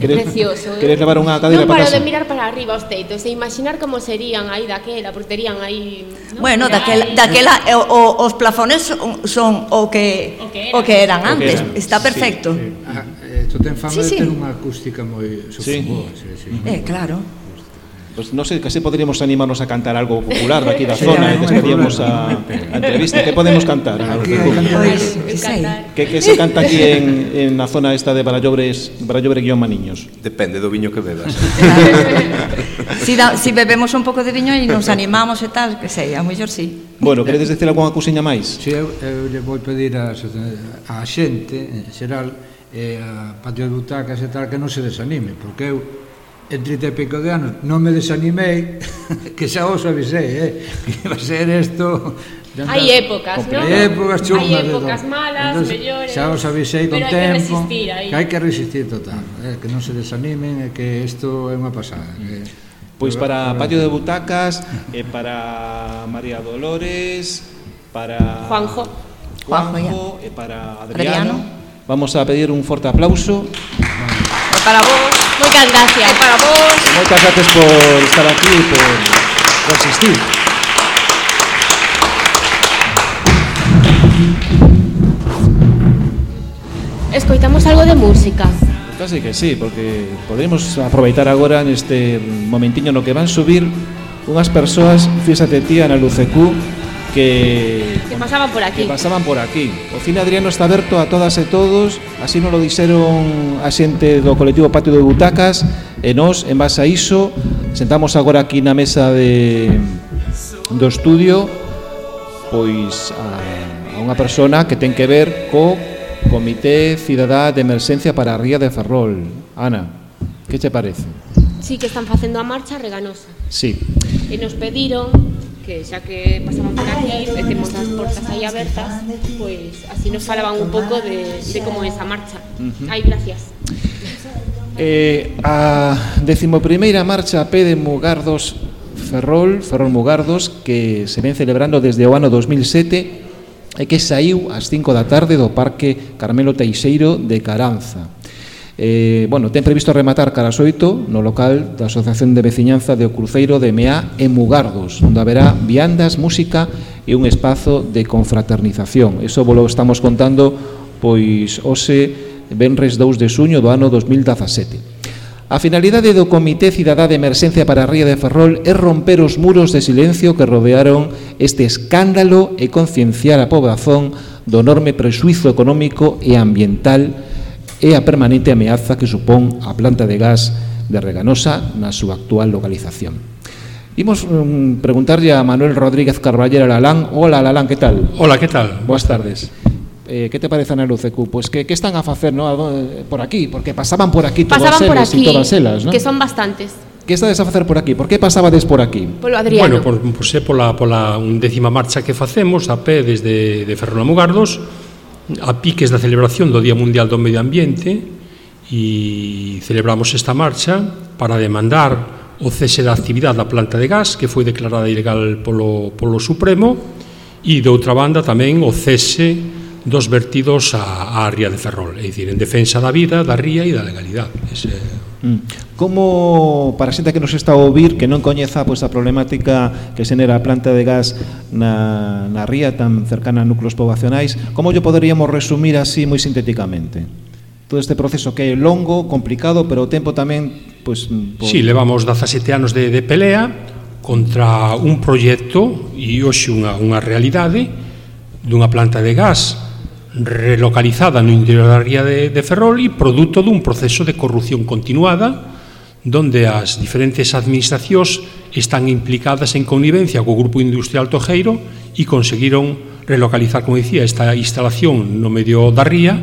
Precioso. Queres levar unha cadeira para casa? Non paro de mirar para arriba os teitos e imaginar como serían aí daquela, porque terían aí... Bueno, daquela os plafones son o que eran antes. Está perfecto. Isto ten fama de ter unha acústica moi boa. Claro. Pues non sei, case poderíamos animarnos a cantar algo popular daqui da zona e despedíamos a entrevista. Que podemos cantar? Que se canta aquí en a zona esta de Barallobre-Maniños? Depende do viño que bebas. Si bebemos un pouco de viño e nos animamos e tal, que sei, a mellor sí. Bueno, queredes decir algunha cousiña máis? Si, eu lle vou pedir a xente, en xeral, a Patio de Butacas e tal, que non se desanime, porque eu en 30 e pico de anos non me desanimei, que xa os avisei, que iba a ser isto. Hai épocas, non? Hai épocas chungas. Hai épocas malas, mellores. Xa os avisei con tempo. Pero hai que resistir aí. Que hai que resistir total, que non se desanimen, e que isto é unha pasada. Pois para Patio de Butacas, e para María Dolores, para Juanjo e para Adriano. Vamos a pedir un forte aplauso. Para vos. Moitas gracias. Para vos. Moitas gracias por estar aquí e por asistir. Escoitamos algo de música. Casi que sí, porque podemos aproveitar agora neste momentiño no que van subir unhas persoas, fíxate tía, na Lucecú, que pasaban por aquí. Que pasaban por aquí. O Cine Adriano está aberto a todas e todos, así nos lo dixeron a xente do colectivo Patio de Butacas, e nós, en base a iso, sentamos agora aquí na mesa do estudio, pois a unha persona que ten que ver co Comité Cidadá de Emerxencia para a Ría de Ferrol. Ana, que te parece? Sí, que están facendo a marcha reganosa. Sí. E nos pediron que xa que pasaban por aquí e temos as portas aí abertas, pois así nos falaban un pouco de como é esa marcha. Ai, gracias. A 11ª marcha a pé de Mugardos Ferrol Mugardos, que se ven celebrando desde o ano 2007 e que saiu ás 5 da tarde do Parque Carmelo Teixeiro de Caranza. Ten previsto rematar cara ás 8 no local da Asociación de Veciñanza de O Cruceiro de Meá e Mugardos, onde haberá viandas, música e un espazo de confraternización. Eso volo estamos contando pois hoxe venres 2 de xuño do ano 2017. A finalidade do Comité Cidadá de Emerxencia para a Ría de Ferrol é romper os muros de silencio que rodearon este escándalo e concienciar a población do enorme prexuízo económico e ambiental e a permanente ameaza que supón a planta de gas de Reganosa na súa actual localización. Imos preguntarlle a Manuel Rodríguez Carballera Lalán. Hola, Lalán, que tal? Hola, que tal? Boas tardes. Que te parece na LUCQ? Pois que están a facer, no, por aquí? Porque pasaban por aquí todas elas e todas elas, non? Que son bastantes. Que estades a facer por aquí? Por que pasabades por aquí? Polo Adriano. Bueno, pois é pola 11ª marcha que facemos a pé desde Ferrol a Mugardos, a piques da celebración do Día Mundial do Medio Ambiente, e celebramos esta marcha para demandar o cese da actividade da planta de gas que foi declarada ilegal polo Supremo, e de outra banda tamén o cese dos vertidos á ría de Ferrol, é dicir, en defensa da vida, da ría e da legalidade. Como, para a xente que nos está a ouvir, que non coñeza a problemática que xenera a planta de gas na ría tan cercana a núcleos poboacionais, como lle poderíamos resumir así moi sintéticamente? Todo este proceso que é longo, complicado, pero o tempo tamén... Sí, levamos 17 anos de pelea contra un proxecto e hoxe unha realidade dunha planta de gas relocalizada no interior da ría de Ferrol e produto dun proceso de corrupción continuada donde as diferentes administracións están implicadas en connivencia co Grupo Industrial Tojeiro e conseguiron relocalizar, como dicía, esta instalación no medio da ría,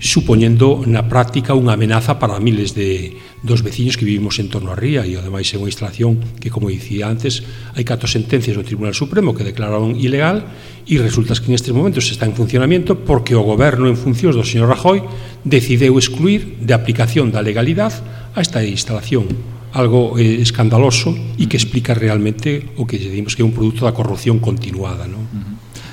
supoñendo na práctica unha amenaza para miles dos veciños que vivimos en torno á ría, e ademais é unha instalación que, como dicía antes, hai 4 sentencias do Tribunal Supremo que declararon ilegal, e resulta que en estes momentos está en funcionamento porque o goberno en funcións do señor Rajoy decideu excluir de aplicación da legalidade a esta instalación, algo escandaloso e que explica realmente o que decimos que é un produto da corrupción continuada, non?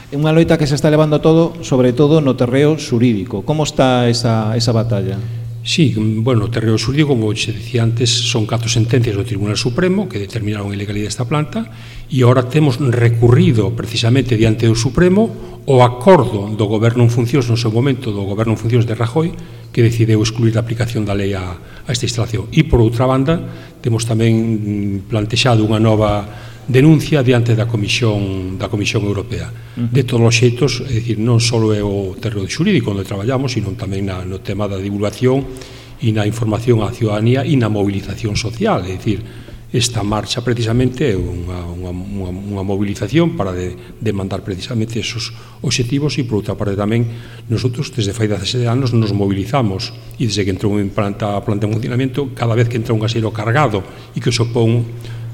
É unha loita que se está levando todo, sobre todo no terreo xurídico. Como está esa batalla? Sí, bueno, o terreo xurídico, como se decía antes, son 4 sentencias do Tribunal Supremo que determinaron a ilegalidade desta planta, e agora temos recurrido precisamente diante do Supremo o acordo do goberno en funcións no seu momento, do goberno en funcións de Rajoy, que decideu excluir a aplicación da lei a esta instalación. E, por outra banda, temos tamén plantexado unha nova denuncia diante da Comisión Europea. De todos os xeitos, é dicir, non só é o terreo xurídico onde traballamos, sino tamén no tema da divulgación e na información á ciudadanía e na movilización social, é dicir, esta marcha precisamente é unha movilización para demandar precisamente esos obxectivos, e por outra parte tamén nosotros desde fai 17 anos nos movilizamos, e desde que entrou en planta en funcionamento, cada vez que entra un gaseiro cargado e que supón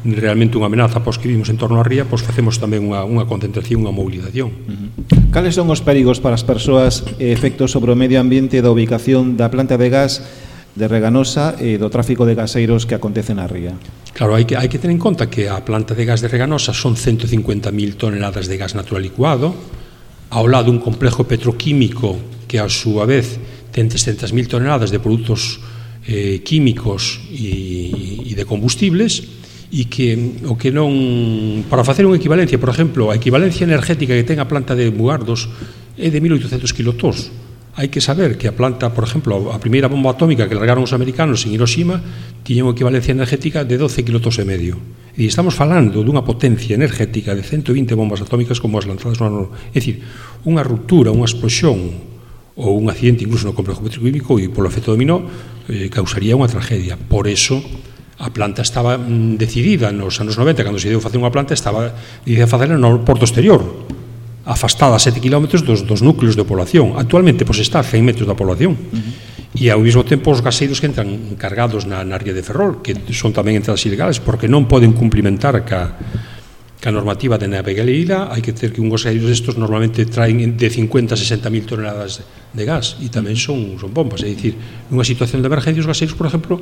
realmente unha amenaza para os que vivimos en torno á ría, pois facemos tamén unha concentración, unha movilización. Cales son os perigos para as persoas e efectos sobre o medio ambiente da ubicación da planta de gas de Reganosa e do tráfico de gaseiros que acontece na ría? Claro, hai que ter en conta que a planta de gas de Reganosa son 150.000 toneladas de gas natural licuado, ao lado un complejo petroquímico que a súa vez ten 300.000 toneladas de produtos químicos e de combustibles, e que o que non, para facer unha equivalencia, por exemplo, a equivalencia energética que ten a planta de Mugardos é de 1.800 kilotons. Hai que saber que a planta, por exemplo, a primeira bomba atómica que largaron os americanos en Hiroshima tiña unha equivalencia energética de 12 kilotons e medio. E estamos falando dunha potencia energética de 120 bombas atómicas como as lanzadas no ano. É dicir, unha ruptura, unha explosión ou un accidente incluso no complejo petroquímico e polo efecto dominó causaría unha tragedia. Por eso a planta estaba decidida nos anos 90, cando se deu facer unha planta, estaba decidida a facela no porto exterior, afastada a 7 km dos núcleos de población. Actualmente, pois, está a 100 metros da población. E ao mesmo tempo os gaseiros que entran cargados na ría de Ferrol, que son tamén entradas ilegales, porque non poden cumplimentar ca normativa de navegabilidade. Hai que ter que un gaseiro destos normalmente traen de 50 a 60 mil toneladas de gas, e tamén son bombas. É dicir, nunha situación de emergencia, os gaseiros, por exemplo,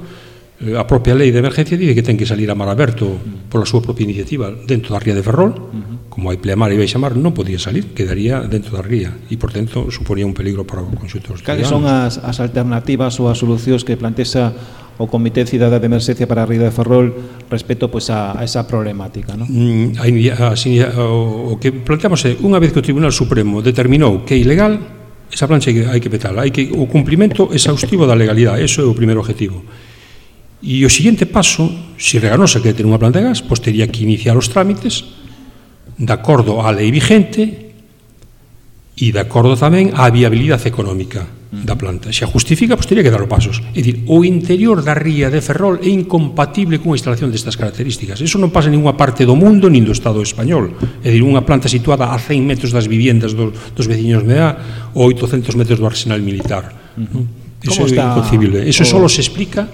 a propia lei de emergencia dice que ten que salir a mar aberto pola súa propia iniciativa dentro da ría de Ferrol. Como hai pleamar e baixamar, non podía salir, quedaría dentro da ría, e, por tanto, suponía un peligro para o conxunto dos ciudadanos. Cales son as alternativas ou as solucións que plantexa o Comité de Cidade de Emerxencia para a ría de Ferrol respecto, pois, a esa problemática, non? O que planteamos é, unha vez que o Tribunal Supremo determinou que é ilegal, esa plancha hai que petala, o cumplimento exhaustivo da legalidade, eso é o primeiro objetivo. E o seguinte paso, se Reganosa quere ter unha planta de gas, pois teria que iniciar os trámites de acordo á lei vigente e de acordo tamén á viabilidade económica da planta. Se a justifica, pois teria que dar os pasos. É dicir, o interior da ría de Ferrol é incompatible cunha instalación destas características. Eso non pasa en ninguna parte do mundo nin do Estado español. É dicir, unha planta situada a 100 metros das viviendas dos veciños de A ou 800 metros do arsenal militar. Eso é inconcebible. Eso só se explica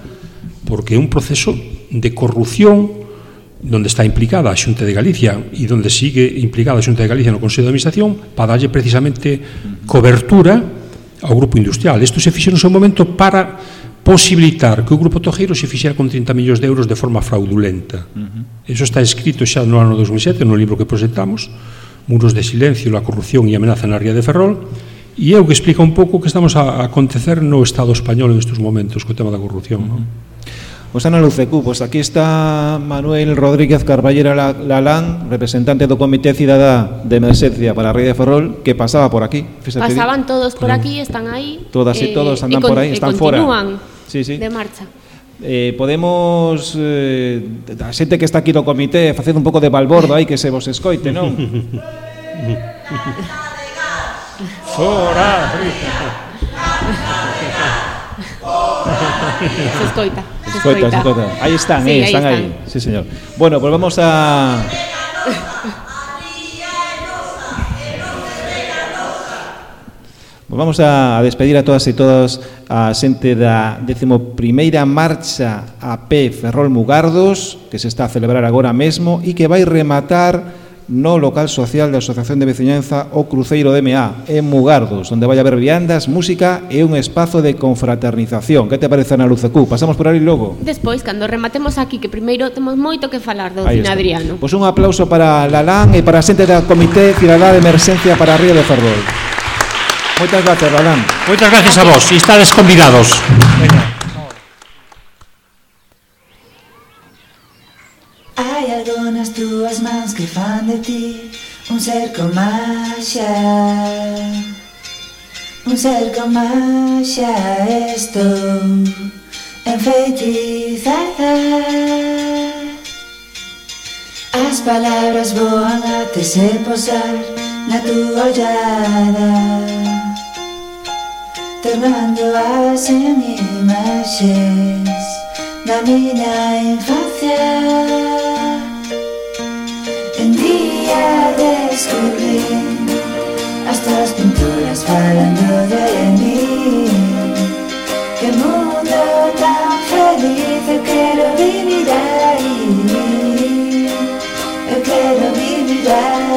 porque é un proceso de corrupción donde está implicada a Xunta de Galicia e donde sigue implicada a Xunta de Galicia no Consello de Administración para darlle precisamente cobertura ao grupo industrial. Isto se fixo no seu momento para posibilitar que o grupo tojeiro se fixera con 30 millóns de euros de forma fraudulenta. Eso está escrito xa no ano 2007 no libro que presentamos, Muros de silencio, la corrupción e amenaza na ría de Ferrol, e é o que explica un pouco o que estamos a acontecer no Estado español en estes momentos co tema da corrupción, non? Pois Ana Lucecu, pois aquí está Manuel Rodríguez Carballera Lalán, representante do Comité Cidadá de Emerxencia para a ría de Ferrol, que pasaba por aquí. Pasaban todos por aquí, están aí. Todas e todos andan por aí, están fora. E continúan de marcha. Podemos, a xente que está aquí no comité, facendo un pouco de balbordo aí, que se vos escoite, non? Fora! Se escoita. Aí están, sí, están aí. Sí, señor. Bueno, pues vamos a despedir a todas e todos a xente da 11ª marcha a pé Ferrol Mugardos, que se está a celebrar agora mesmo e que vai rematar no local social da Asociación de Veciñanza O Cruceiro de MA, en Mugardos, onde vai haber viandas, música e un espazo de confraternización. Que te parece, Ana Lucecu? Pasamos por aí logo? Despois, cando rematemos aquí, que primeiro temos moito que falar do Cine Adriano. Pois un aplauso para Lalán e para a xente da Comité Cidadá de Emerxencia para a ría de Ferrol. Moitas gracias, Lalán. Moitas gracias a vos, e estades convidados. Hai algunhas túas mans que fan de ti un ser con maxia. Un ser con maxia, estou enfeitizada. As palabras voan até se posar na túa ollada, tornando as en imaxes da miña infancia. Un día descubrí as tuas pinturas falando de mí. Que mundo tan feliz, eu quero vivir aí. Eu quero vivir aí.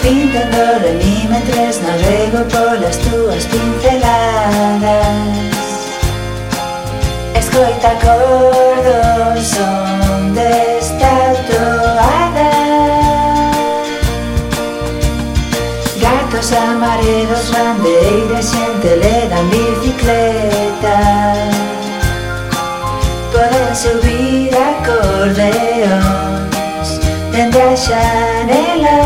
Pintando de milímetros navego polas túas pinceladas. te acordos onde está toada. Gatos amarelos, bandeiras, xente le dan bicicleta. Podense ouvir acordeóns dende a xanela.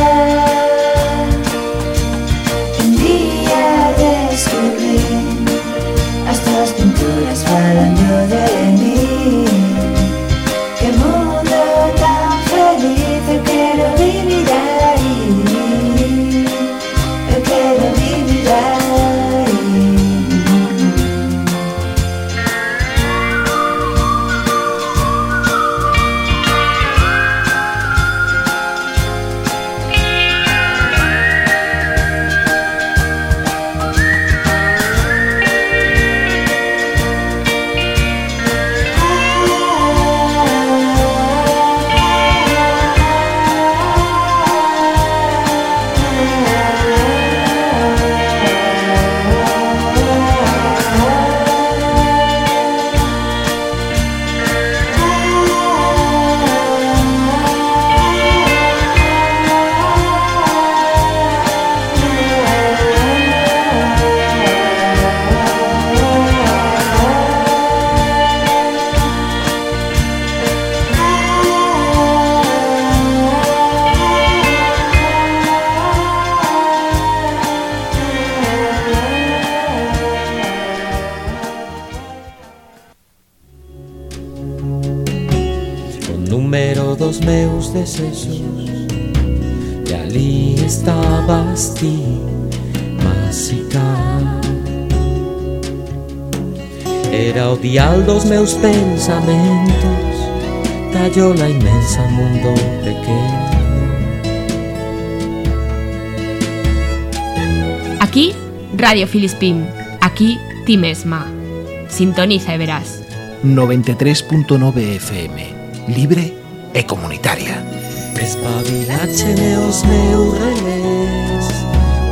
Un día descubrí as tuas pinturas falando de mí. Que mundo tan feliz, eu quero vivir aí. Eu quero vivir aí. Dos meus desexos e ali estabas ti, máxica. Era o dial dos meus pensamentos, tallola inmensa, mundo pequeno. Aquí, Radio Filispín. Aquí, ti mesma. Sintoniza e verás. 93.9 FM. Libre e comunitaria. Espabilácheme os meus relés,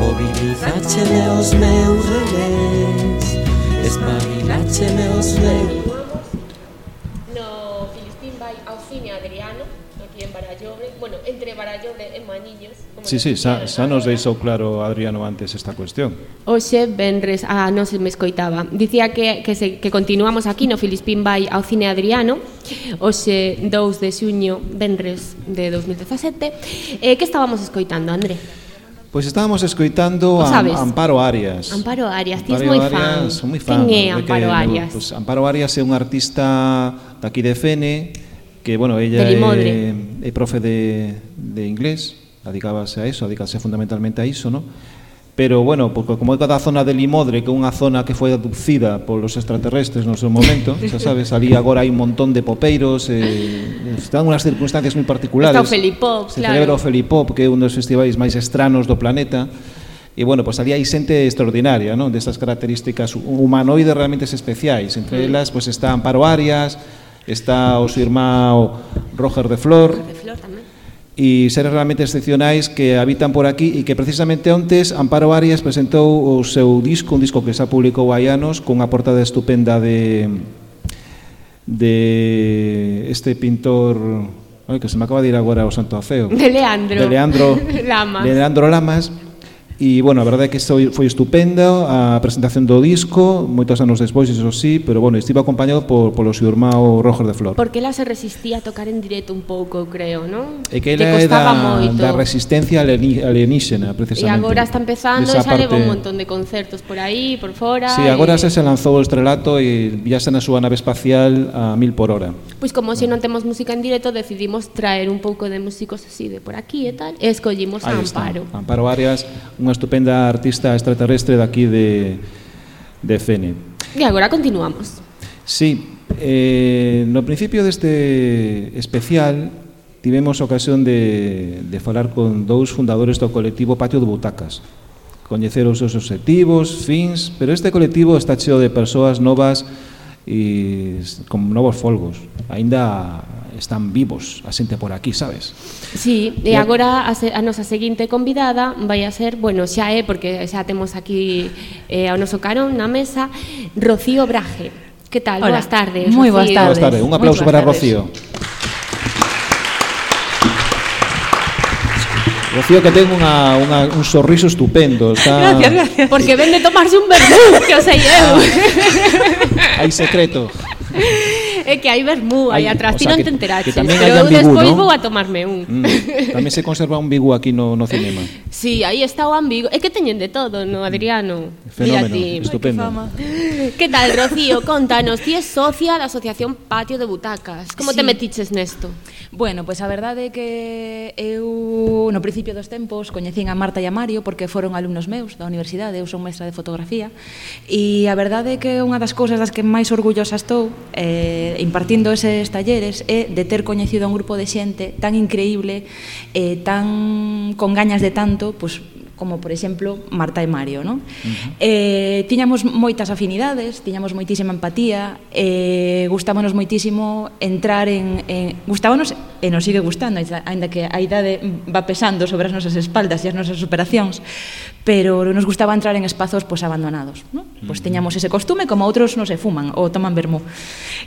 mobilizácheme os meus relés, espabilácheme os meus. No Filispín vai ao cine Adriano, aquí en Barallobre, bueno, entre Barallobre e Maniños. Sí, xa nos deixou claro Adriano antes esta cuestión. Hoxe, venres, non se me escoitaba. Dicía que continuamos aquí no Filispín vai ao cine Adriano, hoxe 2 de xuño, venres de 2017. Que estábamos escoitando, André? Pois estábamos escoitando a Amparo Arias. Amparo Arias, ti és moi fan. Son moi fan. Quen é Amparo Arias? Pues Amparo Arias é unha artista daqui de Fene, que, bueno, ella é profe de inglés, dedicábase a eso, dedicábase fundamentalmente a iso, ¿no? Pero, bueno, porque como é cada zona de Limodre, que é unha zona que foi abducida polos extraterrestres no seu momento, xa sabes, ali agora hai un montón de popeiros, están unhas circunstancias moi particulares. Está o Felipop, se celebra o Felipop, que é un dos festivais máis estranos do planeta, e, bueno, pues ali hai xente extraordinaria, ¿no? Destas características humanoides realmente especiais. Entre elas, pues está Amparo Arias, está o seu irmão Roger de Flor, e seres realmente excepcionais que habitan por aquí e que precisamente ontes Amparo Arias presentou o seu disco, un disco que xa publicou hai anos, con unha portada estupenda de este pintor, que se me acaba de ir agora o santo afeo, de Leandro Lamas. E, bueno, a verdade é que foi estupenda a presentación do disco, moitos anos despois, iso sí, pero, bueno, estivo acompañado polo seu irmão Roger de Flor. Porque ela se resistía a tocar en directo un pouco, creo, non? É que ela é da resistencia alienígena, precisamente. E agora está empezando e xa leva un montón de concertos por aí, por fora. Sí, agora se lanzou o estrelato e viaxa na súa nave espacial a 1000 por hora. Pois como se non temos música en directo, decidimos traer un pouco de músicos así de por aquí e tal, e escollimos a Amparo. Amparo Arias, unha estupenda artista extraterrestre daqui de Fene. E agora continuamos. Sí, no principio deste especial tivemos a ocasión de falar con dous fundadores do colectivo Patio de Butacas, coñecer os seus objetivos, fins, pero este colectivo está cheo de persoas novas e con novos folgos. Aínda están vivos a xente por aquí, sabes? Sí, e agora a nosa seguinte convidada vai a ser, bueno, xa é, porque xa temos aquí ao noso carón na mesa, Rocío Braje. Que tal? Hola. Boas tardes, Moi boas Rocío. tardes. Boas tardes. Un aplauso Moi para boas tardes. Rocío. Rocío que ten un sorriso estupendo. Está... Gracias. Porque ven de tomarse un vermú, que o sei eu. Hai secreto. É que hai vermú aí Hai- atrás, o ti sea, non que- te enteraches, que tamén pero hai eu ambigú, despois ¿no? vou a tomarme un. Tamén se conserva un bigu aquí no cinema. Sí, aí está o ambigo. É que teñen de todo, no, Adriano? Mira Fenómeno, ti. estupendo. Que tal, Rocío? Contanos, ti és socia da Asociación Patio de Butacas. Como te Sí. metiches nesto? Bueno, pois a verdade é que eu no principio dos tempos coñecín a Marta e a Mario porque foron alumnos meus da universidade, eu son mestra de fotografía e a verdade é que unha das cousas das que máis orgullosa estou impartindo eses talleres é de ter coñecido a un grupo de xente tan increíble e tan con gañas de tanto, pois como por exemplo Marta e Mario, non? Tiñamos moitas afinidades, tiñamos moitísima empatía, gustábanos moitísimo entrar gustábanos e nos sigue gustando, aínda que a idade va pesando sobre as nosas espaldas e as nosas superacións, pero nos gustaba entrar en espazos pois abandonados, non? Pois teñamos ese costume como outros non se fuman ou toman vermú.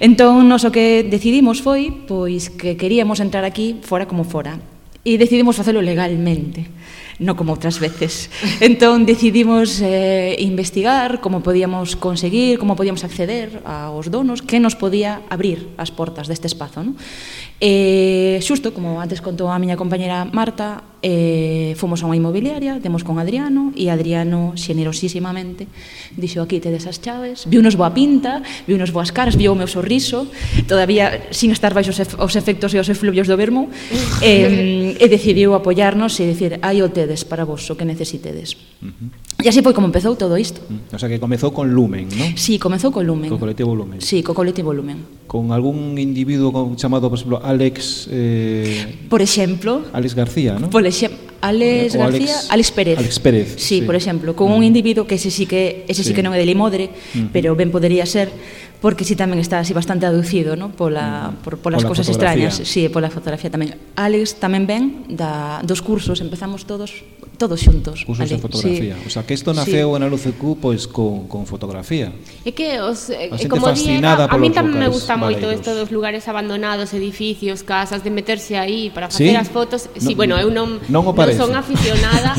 Entón, nos o que decidimos foi pois que queríamos entrar aquí fora como fora e decidimos facelo legalmente, non como outras veces. Entón decidimos investigar como podíamos conseguir, como podíamos acceder aos donos, que nos podía abrir as portas deste espazo, non? Xusto, como antes contou a miña compañera Marta, fomos a unha inmobiliaria, demos con Adriano, e Adriano, xenerosísimamente, dixo aquí tedes as chaves, viunos boa pinta, viunos boas caras, viu o meu sorriso, todavía sin estar baixo os efectos e os efluvios do vermú, e decidiu apoiarnos e dicir, aí o tedes para vos, o que necesitedes. E así foi como empezou todo isto. O sea, que comezou con Lumen, ¿no? Sí, comezou co Lumen. Co colectivo Lumen. Sí, co colectivo Lumen. Con algún individuo chamado, por exemplo, Alex... Por exemplo... Alex García, ¿no? Alex García, Alex Pérez. Alex Pérez, sí, por exemplo, con un individuo que ese sí que non é de Limodre, pero ben podería ser, porque sí tamén está así bastante aducido, ¿no? Polas cousas extrañas, sí, pola fotografía tamén. Alex tamén ven dos cursos, empezamos todos xuntos. Cursos de fotografía. Sí. O sea, que isto naceu en a LUCQ pois con fotografía. É que como fascinada a mí tamén me gusta valeiros. moito isto dos lugares abandonados, edificios, casas, de meterse aí para facer as fotos. Sí, bueno, eu non son aficionada.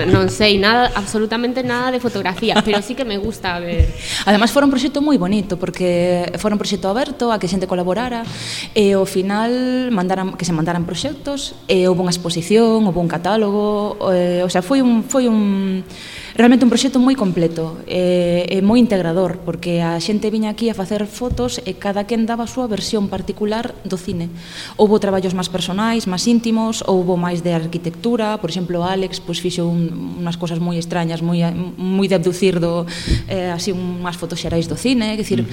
Non sei nada, absolutamente nada de fotografía, pero sí que me gusta ver. Ademais, fora un proxecto moi bonito, porque fora un proxecto aberto a que xente colaborara, e ao final que se mandaran proxectos, e houve unha exposición, houve un catálogo, o sea, foi realmente un proxecto moi completo e moi integrador, porque a xente viña aquí a facer fotos e cada quen daba a súa versión particular do cine. Houbo traballos máis personais, máis íntimos, houbo máis de arquitectura, por exemplo, Alex pois fixo unhas cousas moi extrañas, moi de abducir así unhas fotos xerais do cine, é dicir,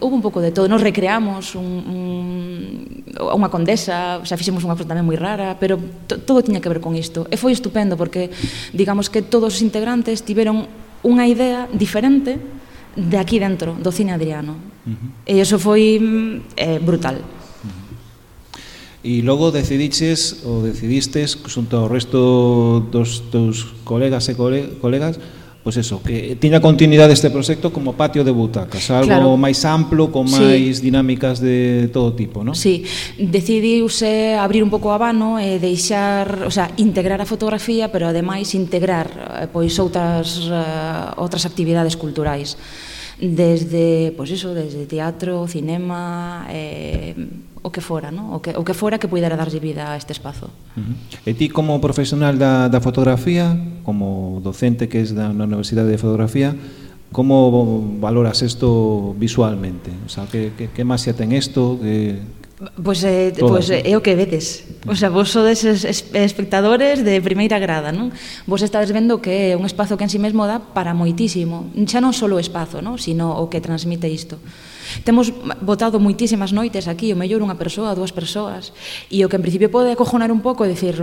houve un pouco de todo. Nos recreamos unha condesa, o sea, fixemos unha cosa tamén moi rara, pero todo tiña que ver con isto. E foi estupendo porque, digamos que todos os integrantes tiveron unha idea diferente de aquí dentro, do cine Adriano. E iso foi brutal. E logo decidistes xunto ao resto dos teus colegas e colegas, pois eso, que tiña continuidade este proxecto como patio de butacas, algo máis amplo, con máis dinámicas de todo tipo, non? Sí, decidiuse abrir un pouco o abano e deixar, o sea, integrar a fotografía, pero ademais integrar pois outras actividades culturais. Desde, pois iso, desde teatro, cinema, o que fora, ¿no? O que fora que puidera darlle vida a este espazo. E ti como profesional da fotografía, como docente que es na Universidade de Fotografía, como valoras isto visualmente? O sea, que máis xa ten isto? Pois é o que vedes. O sea, vos sodes espectadores de primeira grada, non? Vos estades vendo que é un espazo que en si mesmo dá para moitísimo. Xa non só o espazo, non? Sino o que transmite isto. Temos botado moitísimas noites aquí, o mellor unha persoa, dúas persoas, e o que en principio pode acojonar un pouco e dicir,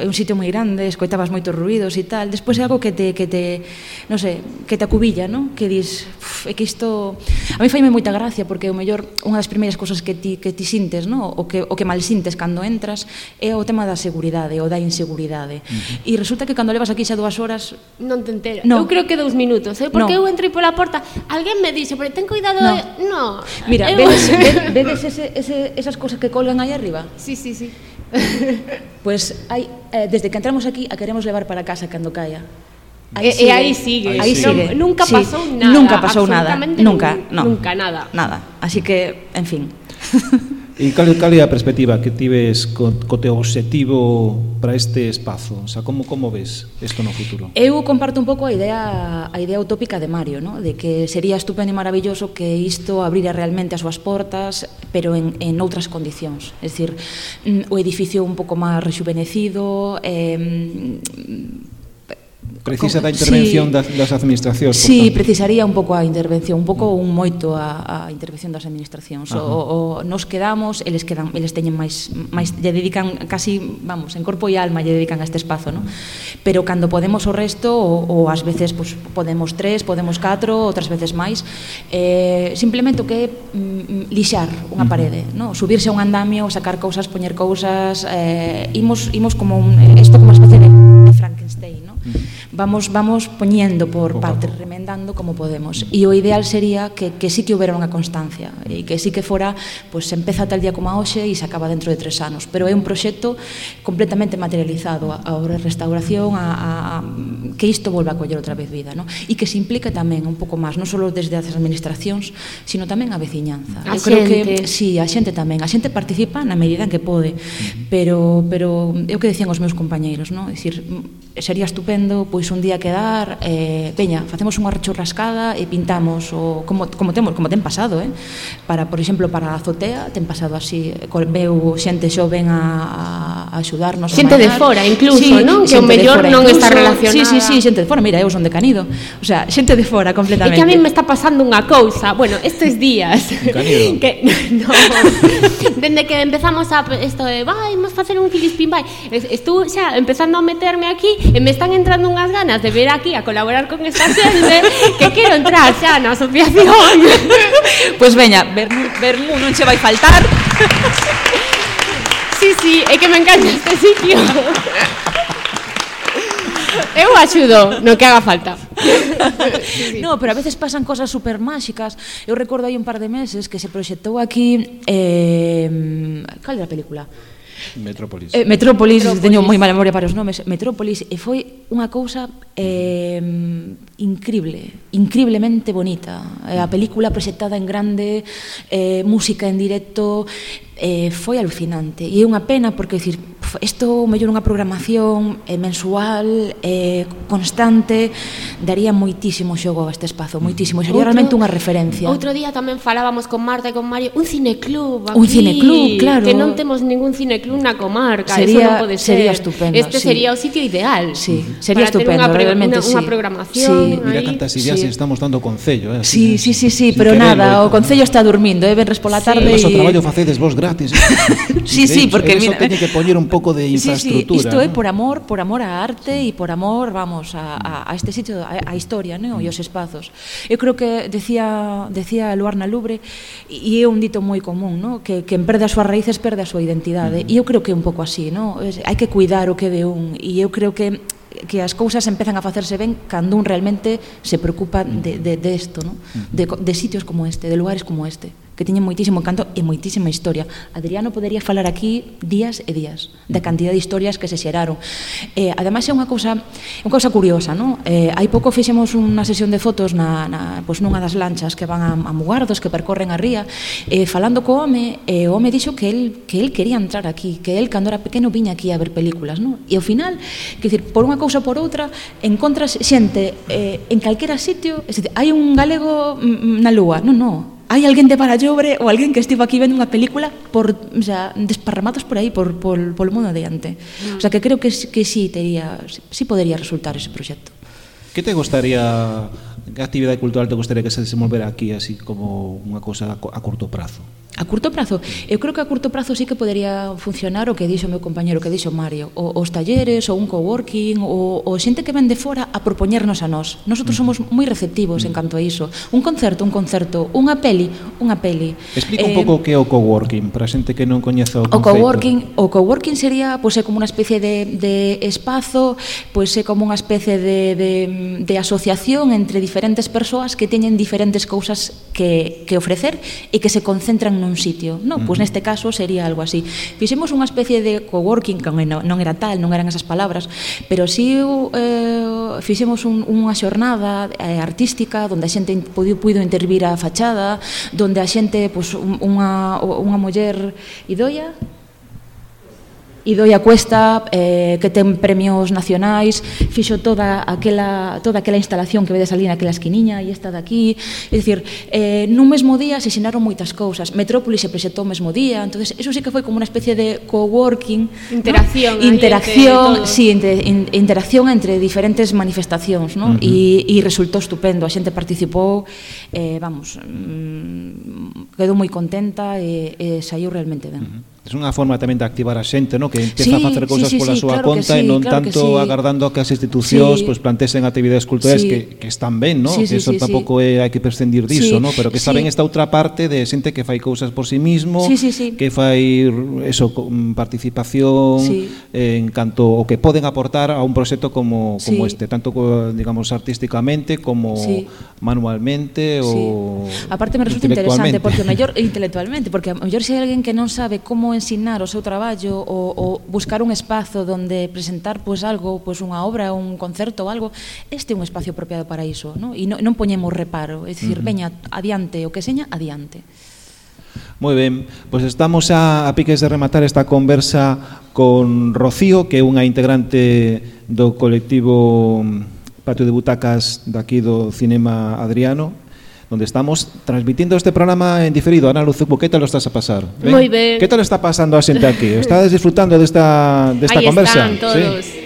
é un sitio moi grande, escoitabas moitos ruidos e tal, despois é algo que te non sei, que te acubilla, non? Que dis, é que isto A mí faime moita gracia porque o mellor unha das primeiras cousas que ti sintes, no? o que mal sintes cando entras é o tema da seguridade ou da inseguridade. E resulta que cando levas aquí xa 2 horas non te enteras. No. Eu creo que 2 minutos, porque eu entrei pola porta, alguén me dixo, pero ten cuidado, no. Mira, vedes esas cousas que colgan aí arriba? Sí. Pues desde que entramos aquí a queremos levar para casa cando caia. E aí sigue. Aí sigue. Nunca Sí. pasou nada. Nunca pasou nada. Absolutamente Nunca, no. Nunca nada. Nada. Así que, en fin. E cal é a perspectiva que tives co teu obxectivo para este espazo? O sea, como ves isto no futuro? Eu comparto un pouco a idea utópica de Mario, ¿no? De que sería estupendo e maravilloso que isto abrira realmente as súas portas, pero en outras condicións. É dicir, o edificio un pouco máis rexuvenecido, Precisa da intervención das administracións. Sí, precisaría un pouco a intervención, un pouco un moito a intervención das administracións. Nos quedamos, eles teñen máis lle dedican casi, vamos, en corpo e alma lle dedican a este espazo, ¿no? Pero cando podemos o resto, ou ás veces pues, podemos 3, podemos 4, outras veces máis, simplemente o que é lixar unha parede, ¿no? Subirse a un andamio, sacar cousas, poñer cousas, imos como isto como unha especie de Frankenstein, ¿no? Vamos poñendo por partes, remendando como podemos. E o ideal sería que sí que houbera unha constancia e que sí que fora, pues empeza tal día como a hoxe e se acaba dentro de 3 anos, pero é un proxecto completamente materializado a restauración, que isto volva a coller outra vez vida, ¿no? E que se implique tamén un pouco máis, non só desde as administracións, sino tamén a veciñanza. A creo xente. que sí, a xente tamén. A xente participa na medida en que pode, pero é o que decían os meus compañeiros, ¿no? É dicir, sería estupendo pois un día quedar, veña, facemos unha churrascada e pintamos como ten pasado, para, por exemplo, para a azotea ten pasado así, veu xente xoven a axudarnos, xente de fora incluso, non? Que o mellor non está relacionada. Sí, xente de fora, mira, eu son de Canido, o sea, xente de fora completamente. É que a mí me está pasando unha cousa, bueno, estes días que no, dende que empezamos isto de vamos facer un Filispín vai, estou xa empezando a meterme aquí e me están entrando unhas ganas de ver aquí a colaborar con esta xente que quero entrar xa na asociación. Pois veña, vermú non che vai faltar. Sí, é que me encanta este sitio. Eu axudo no que haga falta. No, pero a veces pasan cosas super máxicas. Eu recordo aí un par de meses que se proxectou aquí cal era a película? Metrópolis. Metrópolis, teño moi mala memoria para os nomes. Metrópolis, e foi unha cousa increíblemente bonita. A película proxectada en grande, música en directo, foi alucinante. E é unha pena porque, dicir, isto mellor unha programación mensual, constante, daría moitísimo xogo a este espazo, moitísimo. Sería realmente unha referencia. Outro día tamén falábamos con Marta e con Mario, un cineclub aquí. Un cineclub, claro. Que non temos ningún cineclub na comarca, sería, eso non pode ser. Sería estupendo. Este sería o sitio ideal. Sí, sería estupendo, realmente sí. Unha programación. Sí. Mira cantas ideas estamos dando o Concello. Sí, pero nada, o Concello está dormindo, venres pola tarde. O traballo facedes vos gratis. Sí, porque mira, teñe que poñer un pouco de infraestructura. Isto é por amor á arte e por amor, vamos, a este sitio, a historia, non? E os espazos. Eu creo que decía Luarna Lubre, e é un dito moi común, non? Que en perde as súas raíces perde a súa identidade. E eu creo que é un pouco así, non? Hai que cuidar o que de un, e eu creo que as cousas empezan a facerse ben cando un realmente se preocupa de isto, non? De sitios como este, de lugares como este, que teñen moitísimo encanto e moitísima historia. Adriano podería falar aquí días e días da cantidad de historias que se xeraron. Ademais é unha cousa curiosa, non? Hai pouco fixemos unha sesión de fotos pois nunha das lanchas que van a Mugardos, que percorren a ría, falando co home, o home dixo que el quería entrar aquí, que el cando era pequeno viña aquí a ver películas, non? E ao final, que dicir, por unha cousa ou por outra, encontras xente en calquera sitio, é dicir, hai un galego na lúa, non. Hai alguén de Barallobre ou alguén que estivo aquí vendo unha película desparramados por aí, por o mundo adiante. O sea, que creo que sí podería resultar ese proxecto. Que te gustaría, que actividade cultural te gustaría que se desenvolvera aquí así como unha cousa a curto prazo? A curto prazo? Eu creo que a curto prazo sí que podería funcionar o que dixo o meu compañero, o que dixo Mario, os talleres, ou un coworking, ou xente que ven de fora a propoñernos a nós. Nosotros somos moi receptivos en canto a iso. Un concerto, unha peli. Explica un pouco o que é o coworking, para a xente que non coñece o conceito. O coworking sería, pois, é como unha especie de espazo, pois é como unha especie de asociación entre diferentes persoas que teñen diferentes cousas que ofrecer e que se concentran nun sitio, non? Pois neste caso sería algo así. Fixemos unha especie de coworking, que non era tal, non eran esas palabras, pero sí fixemos unha xornada artística onde a xente puido intervir a fachada, onde a xente, pois, unha muller Idoia Cuesta, que ten premios nacionais, fixo toda aquela instalación que vedes ali naquela esquiniña e esta daqui. É dicir, nun mesmo día se xinaron moitas cousas. Metrópolis se presentou o mesmo día, entonces eso sí que foi como unha especie de coworking, interacción, ¿no? Interacción entre diferentes manifestacións, ¿no? E resultou estupendo, a xente participou, quedou moi contenta e saiu realmente ben. É unha forma tamén de activar a xente, no? Que empeza a facer cousas pola súa conta e non tanto agardando a que as institucións plantesen actividades culturais que están ben, no? Que eso tampouco hai que prescindir diso, no? Pero que saben esta outra parte de xente que fai cousas por si mismo, que fai eso, participación en canto o que poden aportar a un proxecto como este, tanto digamos artísticamente como manualmente ou aparte me resulta interesante porque intelectualmente, porque a mellor se hai alguén que non sabe como ensinar o seu traballo ou buscar un espazo onde presentar pois algo, pois unha obra, un concerto ou algo, este é un espacio apropiado para iso, non? E non poñemos reparo, é dicir, veña, adiante, o que seña, adiante. Moi ben, pois estamos a piques de rematar esta conversa con Rocío, que é unha integrante do colectivo Patio de Butacas daqui do Cinema Adriano, donde estamos transmitindo este programa en diferido. Ana Luzucu, ¿qué tal lo estás a pasar? ¿Ven? Muy bien. ¿Qué tal está pasando a xente aquí? ¿Estás disfrutando de esta conversa? Ahí están todos. ¿Sí?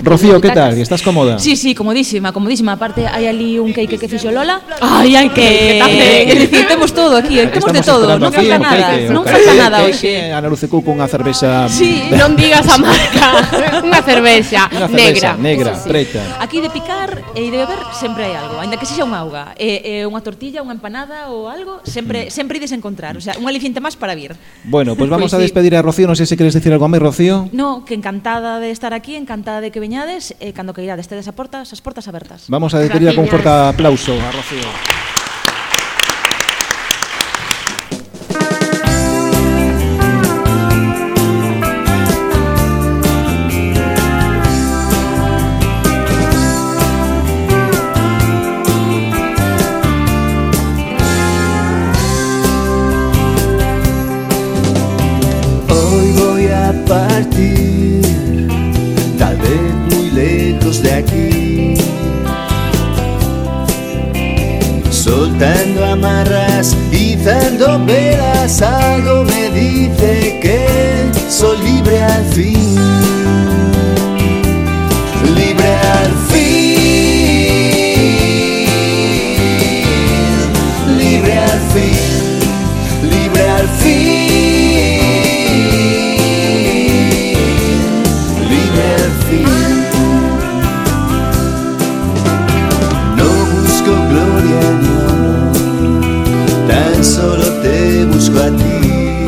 Rocío, ¿qué tal? ¿Estás cómoda? Sí, comodísima. Aparte hai ali un cake que fixo Lola. Ai, que tamén. Temos todo aquí, temos de todo, non falta nada. Non falta nada hoxe. Ana Luzucu con unha cervexa. Sí, non digas a marca. Unha cervexa negra, preta. Aquí de picar e de beber sempre hai algo, aínda que sexa unha auga, unha tortilla, unha empanada ou algo, sempre ides encontrar, o sea, un aliciente máis para vir. Bueno, pues vamos a despedir a Rocío, non sei se queres decir algo máis, Rocío. No, que encantada de estar aquí, encantada de que veñades, cando que irades tedes as portas abertas. Vamos a despedir con un forte aplauso a Rocío. Hoy voy a partir, tal vez muy lejos de aquí, soltando amarras, izando velas, algo me dice que soy libre al fin, libre al fin, libre al fin, libre al fin. Solo te busco a ti,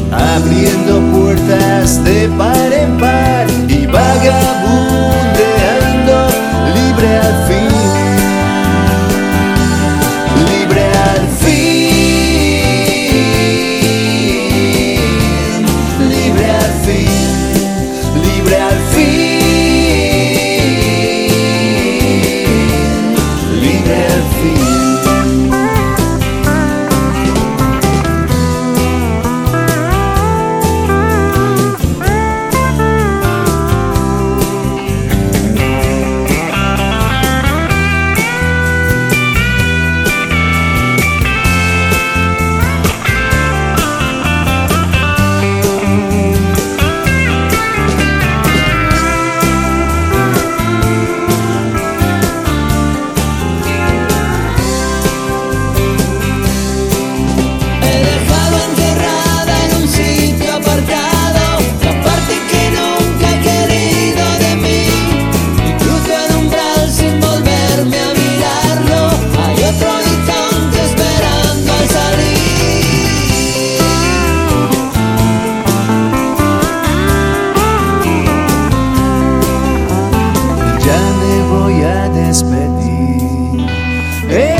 abriendo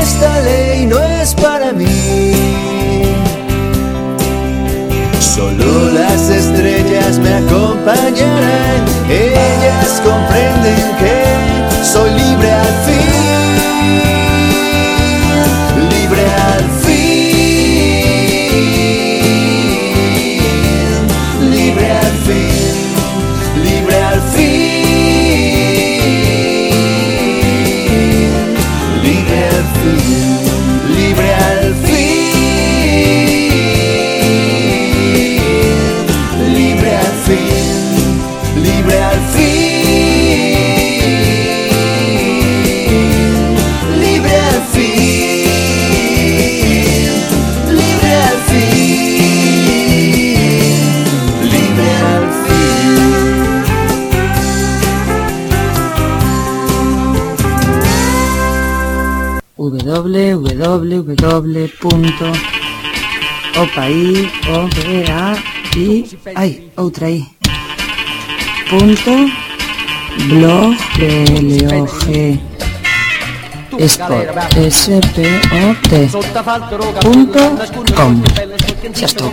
esta ley no es para mí. Solo las estrellas me acompañarán, ellas comprenden que soy libre al fin, libre al fin, libre al fin, libre al fin, libre al fin, libre al fin. Libre al fin, libre al fin, libre al fin, libre al www.opai.blogspot.com. Xa estou.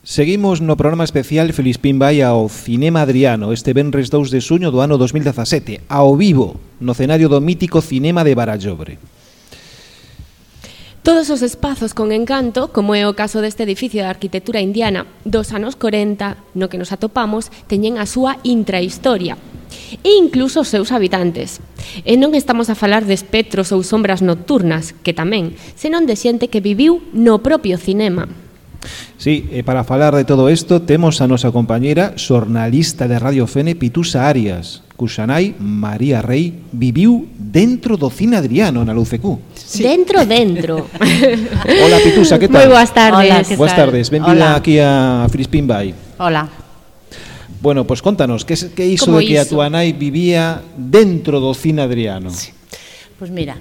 Seguimos no programa especial Filispín vai ao Cinema Adriano este venres 2 de suño do ano 2017, ao vivo, no cenario do mítico Cinema de Barallobre. Todos os espazos con encanto, como é o caso deste edificio de arquitectura indiana dos anos 40, no que nos atopamos, teñen a súa intrahistoria, e incluso os seus habitantes. E non estamos a falar de espectros ou sombras nocturnas, que tamén, senón de xente que viviu no propio cinema. Sí, e para falar de todo isto temos a nosa compañera xornalista de Radio Fene, Pitusa Arias, cuxa nai, María Rey, viviu dentro do Cine Adriano na LUCQ. Sí. Dentro. Hola Pitusa, que tal? Moi boas tardes. Hola, que boas tardes, benvida aquí a Filispín vai. Hola. Bueno, pues contanos, que iso de que a túa nai vivía dentro do Cine Adriano? Sí. Pues mira,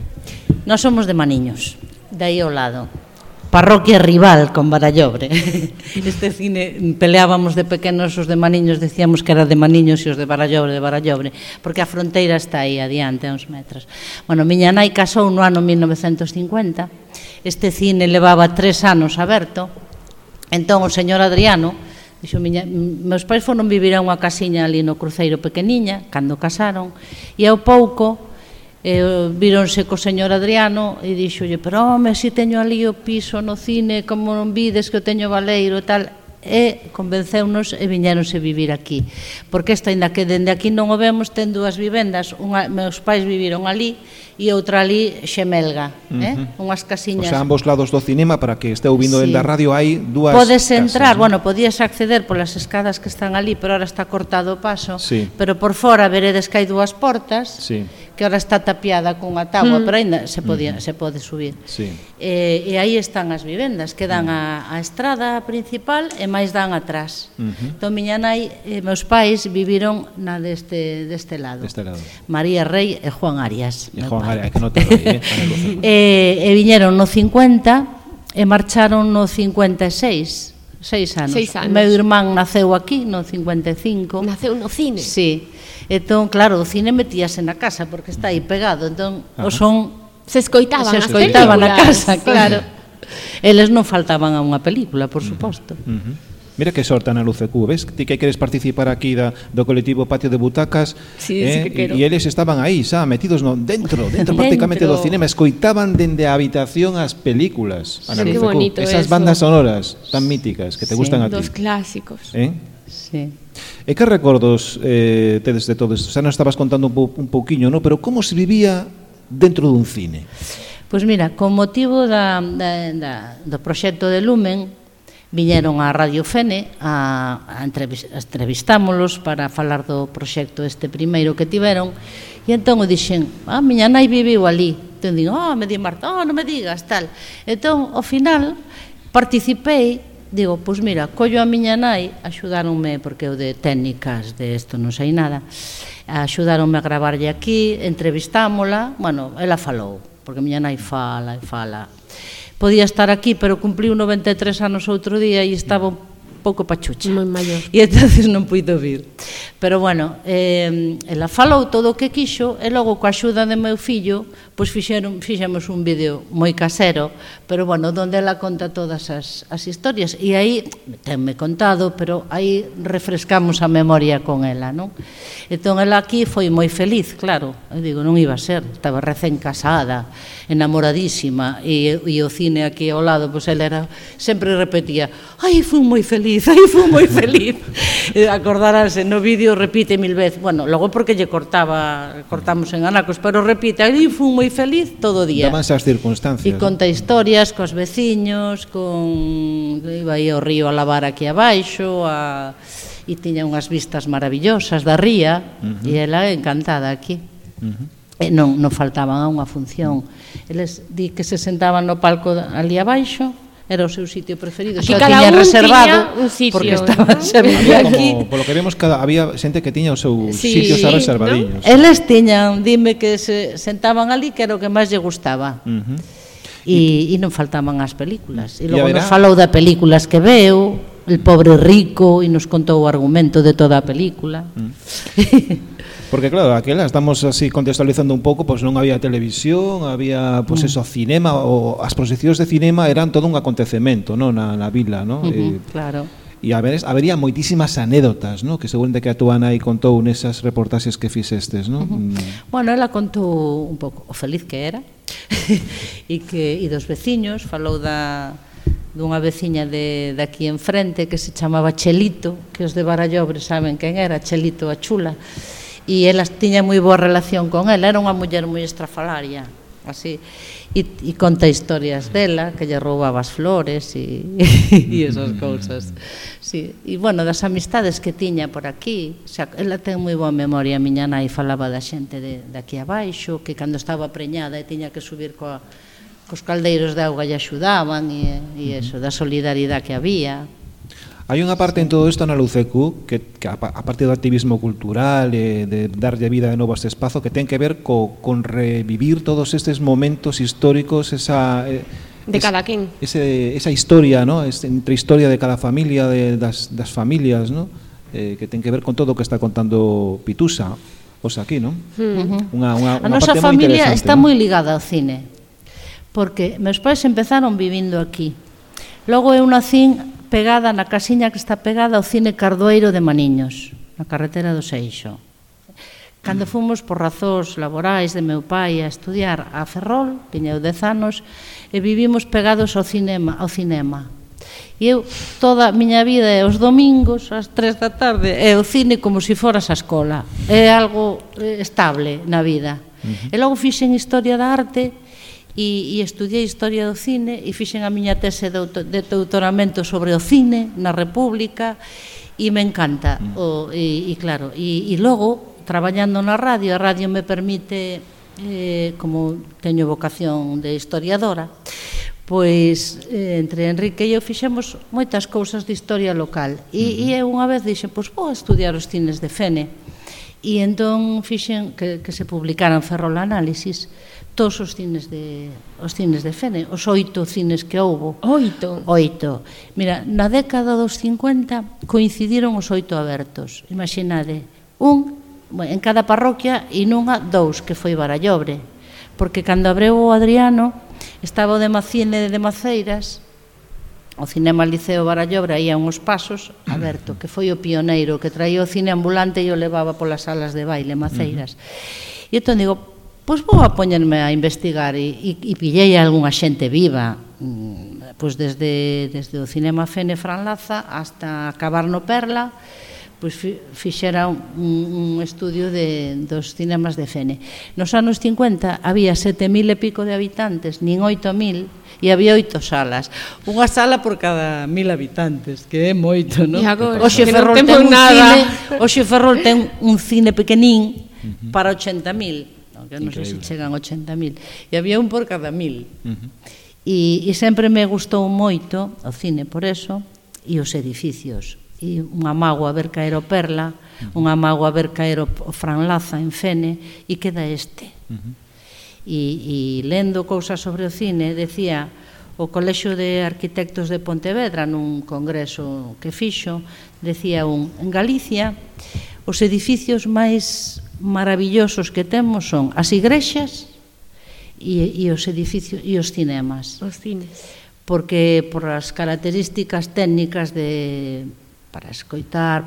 nós somos de Maniños, de aí ao lado. Parroquia rival con Barallobre. Este cine peleábamos de pequenos, os de Maniños decíamos que era de Maniños e os de Barallobre, porque a fronteira está aí adiante, a uns metros. Bueno, miña nai casou no ano 1950, este cine levaba 3 anos aberto, entón o señor Adriano dixo, meus pais foron vivir a unha casiña ali no Cruceiro pequeniña, cando casaron, e ao pouco víronse co señor Adriano e dixolle, pero home, se teño ali o piso no cine, como non vides que o teño baleiro e tal, e convenceunos e viñéronse vivir aquí, porque esta, ainda que dende aquí non o vemos, ten 2 vivendas, meus pais viviron ali e outra ali xemelga, unhas casiñas. O sea, ambos lados do cinema, para que esteu vindo dende a radio, hai 2 podes casas, entrar, ¿no? bueno, podías acceder polas escadas que están ali, pero ahora está cortado o paso, sí. Pero por fora veredes que hai 2 portas, sí. Que ahora está tapiada cunha táboa, pero ainda se pode subir. Sí. E aí están as vivendas, que dan a estrada principal e máis dan atrás. Entón, miña nai e meus pais viviron na deste lado. María Rey e Juan Arias. E Juan Arias, que non te rei, e viñeron no 50 e marcharon no 56. 6 anos. 6 anos. Meu irmán naceu aquí no 55. Naceu no cine. Sí. Entón, claro, o cine metíase na casa porque está aí pegado. Entón, o son se escoitaban na casa, claro. Eles non faltaban a unha película, por suposto. Mira que sorte na LUCQ, ves? Ti que queres participar aquí do colectivo Patio de Butacas, sí, sí que quero. E eles estaban aí, xa, metidos dentro prácticamente do cinema, escoitaban dende a habitación as películas. Sí, que bonito esas eso. Bandas sonoras tan míticas que te gustan a ti. Dos clásicos. Sí. E que recordos tedes de todo isto? Xa nos estabas contando un pouquiño, ¿no? Pero como se vivía dentro dun cine? Pois mira, con motivo do proxecto de Lumen, viñeron a Radio Fene a entrevistámolos para falar do proxecto este primeiro que tiveron, e entón o dixen, miña nai viviu ali. Entón digo, me di Marta, non me digas, tal. Entón, ao final, participei, digo, pois mira, collo a miña nai, axudáronme, porque eu de técnicas de isto non sei nada, axudáronme a gravarlle aquí, entrevistámola, bueno, ela falou, porque miña nai fala e fala. Podía estar aquí, pero cumpliu 93 anos outro día e estaba un pouco pachucha. Moi maior. E entonces non puido vir. Pero, bueno, ela falou todo o que quixo e logo, coa axuda de meu fillo, pois fixemos un vídeo moi casero, pero, bueno, onde ela conta todas as historias. E aí, tenme contado, pero aí refrescamos a memoria con ela, non? Entón, ela aquí foi moi feliz, claro. Eu digo, non iba a ser, estaba recén casada, enamoradísima, e o cine aquí ao lado, pois ela era, sempre repetía, ai, fui moi feliz, ai, fui moi feliz. Acordaránse, no vídeo repite 1000 veces, bueno, logo porque lle cortamos en anacos, pero repite, ai, fui moi feliz todo o día. Damanse as circunstancias. E conta historias cos veciños, iba aí ao río a lavar aquí abaixo, e tiña unhas vistas maravillosas da ría, e ela encantada aquí. E non faltaban a unha función. Eles di que se sentaban no palco ali abaixo, era o seu sitio preferido, xa o tiña reservado porque estaban sempre aquí. Polo que vemos, había xente que tiña os seus sitios reservadiños. Eles tiñan, dime que se sentaban ali, que era o que máis lle gustaba. E non faltaban as películas. E logo nos falou de películas que veu, El pobre rico, e nos contou o argumento de toda a película. Porque claro, aquela estamos así contextualizando un pouco, pois non había televisión, había pois eso, cinema, ou as proxeccións de cinema eran todo un acontecemento, non, na vila, non? Claro. E habería moitísimas anécdotas, non? Que seguramente que a túa nai contou nesas reportaxes que fixestes, non? Bueno, ela contou un pouco o feliz que era e dos veciños, falou dunha veciña de aquí enfrente que se chamaba Chelito, que os de Barallobre saben quen era, Chelito a chula, e elas tiña moi boa relación con ela, era unha muller moi estrafalaria, así, e conta historias dela, que lle roubaba as flores e esas cousas. Sí. E, bueno, das amistades que tiña por aquí, o sea, ela ten moi boa memoria, a miña nai falaba da xente de aquí abaixo, que cando estaba preñada e tiña que subir cos caldeiros de auga lle axudaban e eso, da solidaridade que había. Hai unha parte en todo isto na Lucecu que a parte do activismo cultural e de darlle vida de novo a este espazo que ten que ver con revivir todos estes momentos históricos, de cada quen. Esa historia, ¿no? Entre historia de cada familia, das familias, ¿no? Que ten que ver con todo o que está contando Pitusa, os aquí, ¿no? A nosa familia está moi ligada ao cine, porque meus pais empezaron vivindo aquí. Logo eu nacín pegada na casiña que está pegada ao cine Cardoeiro de Maniños, na carretera do Seixo. Cando fomos por razóns laborais de meu pai a estudiar a Ferrol, tiña eu 10 anos, e vivimos pegados ao cinema. E eu, toda a miña vida, os domingos, ás 3 da tarde, é o cine como se foras a escola. É algo estable na vida. E logo fixen Historia da Arte, e estudiei Historia do Cine e fixen a miña tese de doutoramento sobre o cine na República e me encanta e claro, e logo traballando na radio, a radio me permite como teño vocación de historiadora, pois entre Enrique e eu fixemos moitas cousas de historia local e eu unha vez dixen, pois vou estudiar os cines de Fene e entón fixen que se publicaran Ferrol Análisis todos os cines de Fene, os 8 cines que houbo. 8? 8. Mira, na década dos 50 coincidiron os 8 abertos. Imaginade, en cada parroquia e nunha 2, que foi Barallobre. Porque cando abreu o Adriano, estaba o Demacine de Maceiras, o Cinema Liceo Barallobre aí a uns pasos, aberto, que foi o pioneiro, que traía o cine ambulante e o levaba polas salas de baile Maceiras. E entón digo, pois vou a poñerme a investigar e pillei a algunha xente viva, pois desde o Cinema Fene Fran Laza hasta acabar no Perla, pois fixera un estudio dos cinemas de Fene. Nos anos 50 había 7.000 e pico de habitantes, nin 8.000, e había 8 salas. Unha sala por cada 1.000 habitantes, que é moito, non? Oxe Ferrol ten un cine pequenín para 80.000, que non sei se chegan 80.000, e había un por cada 1.000. E sempre me gustou moito o cine por eso, e os edificios. E unha mágoa ver caer o Perla, unha mágoa ver caer o Fran Laza en Fene, e queda este. E lendo cousas sobre o cine, decía o Colexio de Arquitectos de Pontevedra nun congreso que fixo, decía en Galicia os edificios máis maravillosos que temos son as igrexas e os edificios e os cinemas. Os cines. Porque por as características técnicas para escoitar,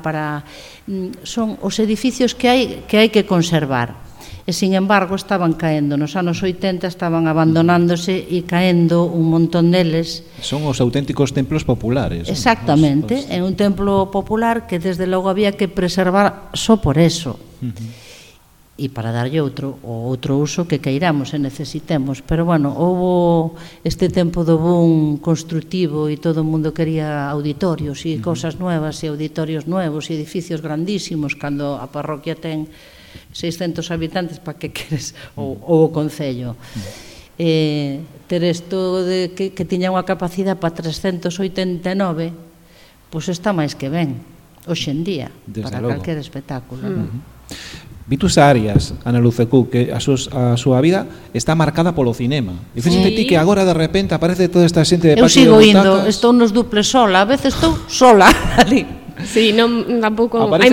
son os edificios que hai que conservar. E, sin embargo, estaban caendo. Nos anos 80 estaban abandonándose e caendo un montón deles. Son os auténticos templos populares. Exactamente. É un templo popular que, desde logo, había que preservar só por eso. E para darlle outro uso que queiramos e necesitemos. Pero, bueno, houve este tempo do boom constructivo e todo o mundo quería auditorios e cosas nuevas e auditorios nuevos e edificios grandísimos, cando a parroquia ten 600 habitantes, para que queres, ou o concello. Ter isto de que tiña unha capacidade para 389, pois está máis que ben, hoxe en día, para calquer espectáculo. Vitusa Arias, Ana Lucecú, que a súa vida está marcada polo cinema. E fíxate ti que agora de repente aparece toda esta xente de patio de butacas. Eu sigo indo, estou nos duples sola, a veces estou sola ali. Sí, non tampouco é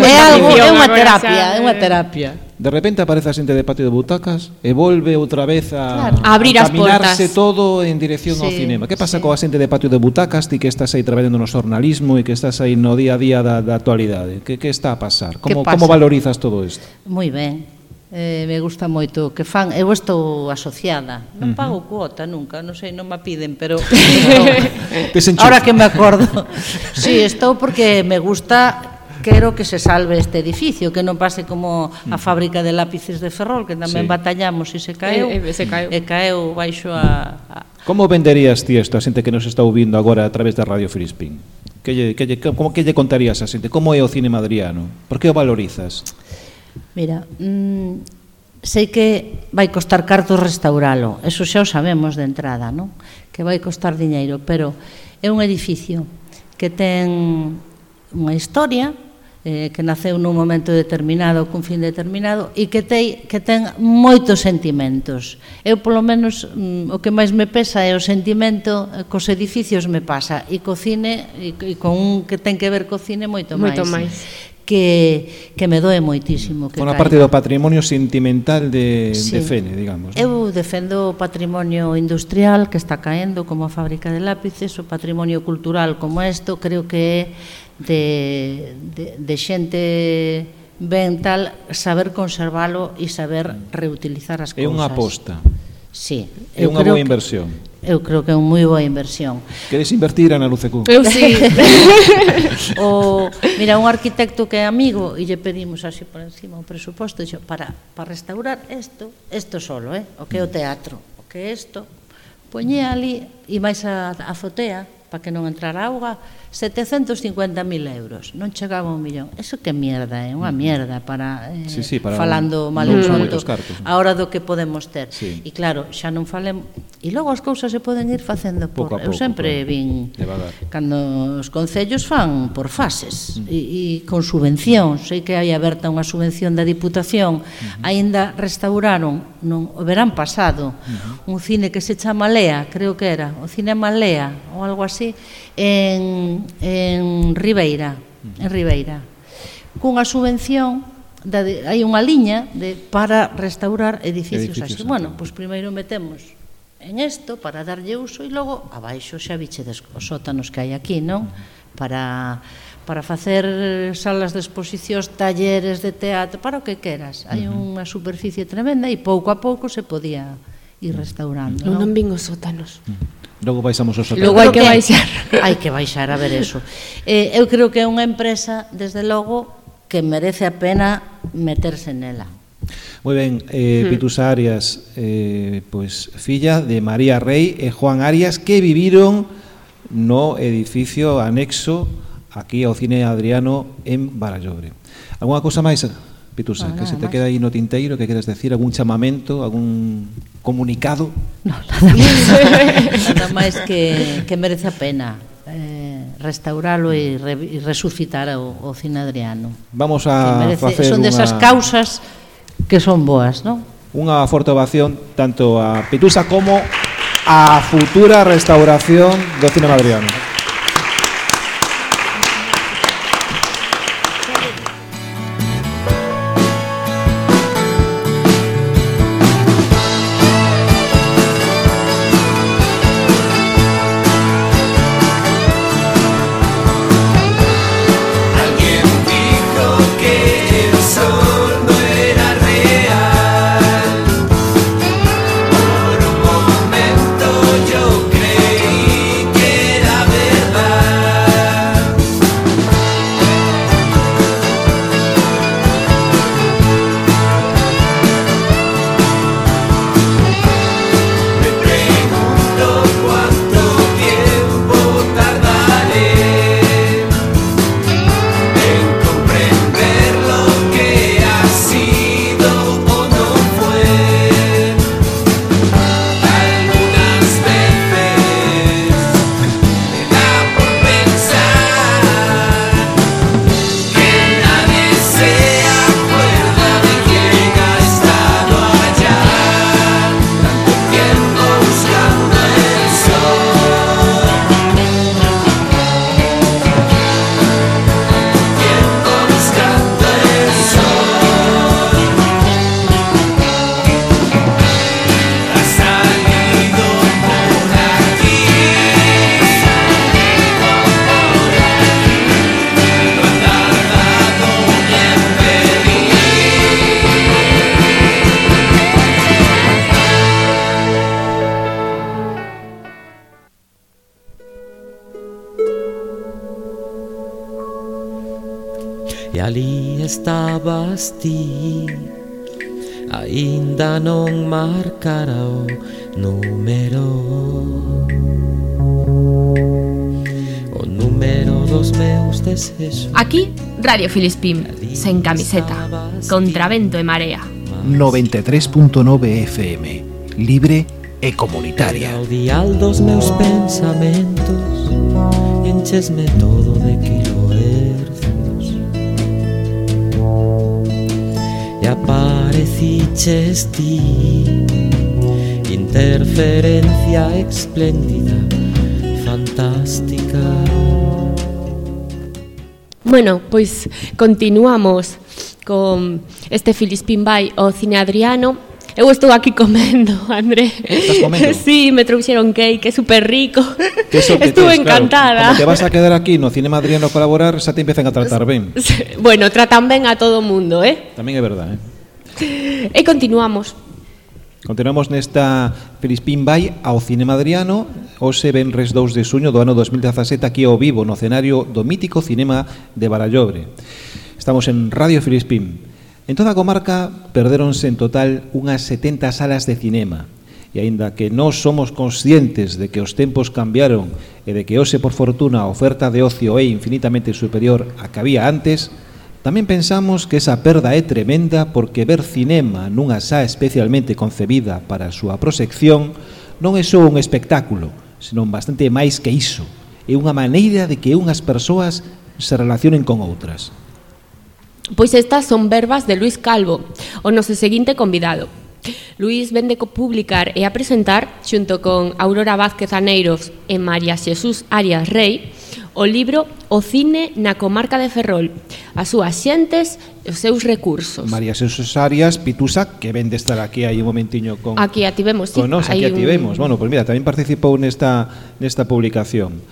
unha terapia. De repente aparece a xente de patio de butacas e volve outra vez a abrir as portas. Caminarse todo en dirección ao cinema. Que pasa coa xente de patio de butacas, ti que estás aí traballando no xornalismo e que estás aí no día a día da actualidade? Que está a pasar? Como valorizas todo isto? Moi ben. Me gusta moito que fan. Eu estou asociada, non pago cuota nunca, non sei, non me piden, pero ahora que me acordo, sí, estou porque me gusta. Quero que se salve este edificio, que non pase como a fábrica de lápices de Ferrol, que tamén batallamos e se caeu, e caeu baixo a... Como venderías ti isto a xente que nos está ouvindo agora a través da Radio Filispín? Como que lle contarías a xente? Como é o cine madriano? Por que o valorizas? Mira, sei que vai costar cartos restauralo, eso xa o sabemos de entrada, non? Que vai costar diñeiro, pero é un edificio que ten unha historia, que naceu nun momento determinado, cun fin determinado, e que ten moitos sentimentos. Eu, polo menos, o que máis me pesa é o sentimento cos edificios me pasa, e co cine, e con un que ten que ver co cine moito máis. Que me doe moitísimo. Forma parte do patrimonio sentimental de Fene, digamos. Eu defendo o patrimonio industrial que está caendo, como a fábrica de lápices, o patrimonio cultural como isto, creo que é de xente ben tal, saber conservalo e saber reutilizar as cousas. É unha aposta. Sí. É unha boa inversión. Eu creo que é unha moi boa inversión. Queres invertir, Ana Lucecú? Eu sí. Mira, un arquitecto que é amigo e lle pedimos así por encima o presuposto, dixo, para restaurar isto solo, o que é o teatro, o que é isto, poñe ali e máis a azotea para que non entrara auga, 750.000 euros, non chegaba a 1 millón. Eso que mierda, é unha mierda para falando mal en pronto a hora do que podemos ter. E claro, xa non falemos, e logo as cousas se poden ir facendo por... Eu sempre vin cando os concellos fan por fases e con subvención. Sei que hai aberta unha subvención da Diputación. Aínda restauraron o verán pasado un cine que se chama Lea, creo que era o Cinema Lea ou algo así, en Ribeira, cunha subvención, hai unha liña para restaurar edificios así. Bueno, pois primeiro metemos en isto para darlle uso e logo abaixo xa bichedes os sótanos que hai aquí, non? Para facer salas de exposicións, talleres de teatro, para o que queras. Hai unha superficie tremenda e pouco a pouco se podía ir restaurando. Non vin os sótanos. Logo baixamos os sótanos. Logo hai que baixar. Hai que baixar a ver eso. Eu creo que é unha empresa, desde logo, que merece a pena meterse nela. Moi ben, Vitusa Arias, pois filla de María Rey e Juan Arias, que viviron no edificio anexo aquí ao Cine Adriano en Barallobre. Alguna cousa máis, Vitusa, que se te queda aí no tinteiro, que queres decir, algún chamamento, algún comunicado? No, nada máis que merece a pena restauralo e resucitar o Cine Adriano. Vamos a facer son desas causas que son boas, non? Unha forte ovación tanto a Vitusa como a futura restauración do Cine Adriano. E ali estabas ti, aínda non marcara o número, o número dos meus desexos. Aquí, Radio Filispín, sen camiseta, contra vento e marea. 93.9 FM, libre e comunitaria. O dial dos meus pensamentos, enchesme todo de kilohercios. E apareciches ti, interferencia espléndida, fantástica. Bueno, pois continuamos con este Filispín vai ao Cine Adriano. Eu estou aquí comendo, André. Estás comendo? Sí, me trouxeron cake, é super rico. Estuve Estuve encantada. Claro, como te vas a quedar aquí no Cinema Adriano a colaborar, xa te empiezan a tratar ben. Bueno, tratan ben a todo o mundo, Tamén é verdade, E continuamos. Continuamos nesta Filispín vai ao Cinema Adriano. Hoxe venres 2 de suño do ano 2017 aquí ao vivo no escenario do mítico Cinema de Barallobre. Estamos en Radio Filispín. En toda a comarca perdéronse en total unhas 70 salas de cinema. E aínda que nós somos conscientes de que os tempos cambiaron e de que hoxe, por fortuna, a oferta de ocio é infinitamente superior a que había antes, tamén pensamos que esa perda é tremenda porque ver cinema nunha sala especialmente concebida para a súa proxección non é só un espectáculo, senón bastante máis que iso. É unha maneira de que unhas persoas se relacionen con outras. Pois estas son verbas de Luis Calvo, o noso seguinte convidado. Luis vende publicar e a presentar, xunto con Aurora Vázquez Aneiros e María Xesús Arias Rey, o libro O cine na comarca de Ferrol, as súas xentes e os seus recursos. María Xesús Arias Pitusa, que ven de estar aquí aí un momentiño con... Aquí ativemos, sí. Con nos, aquí ativemos. Bueno, pois mira, tamén participou nesta publicación.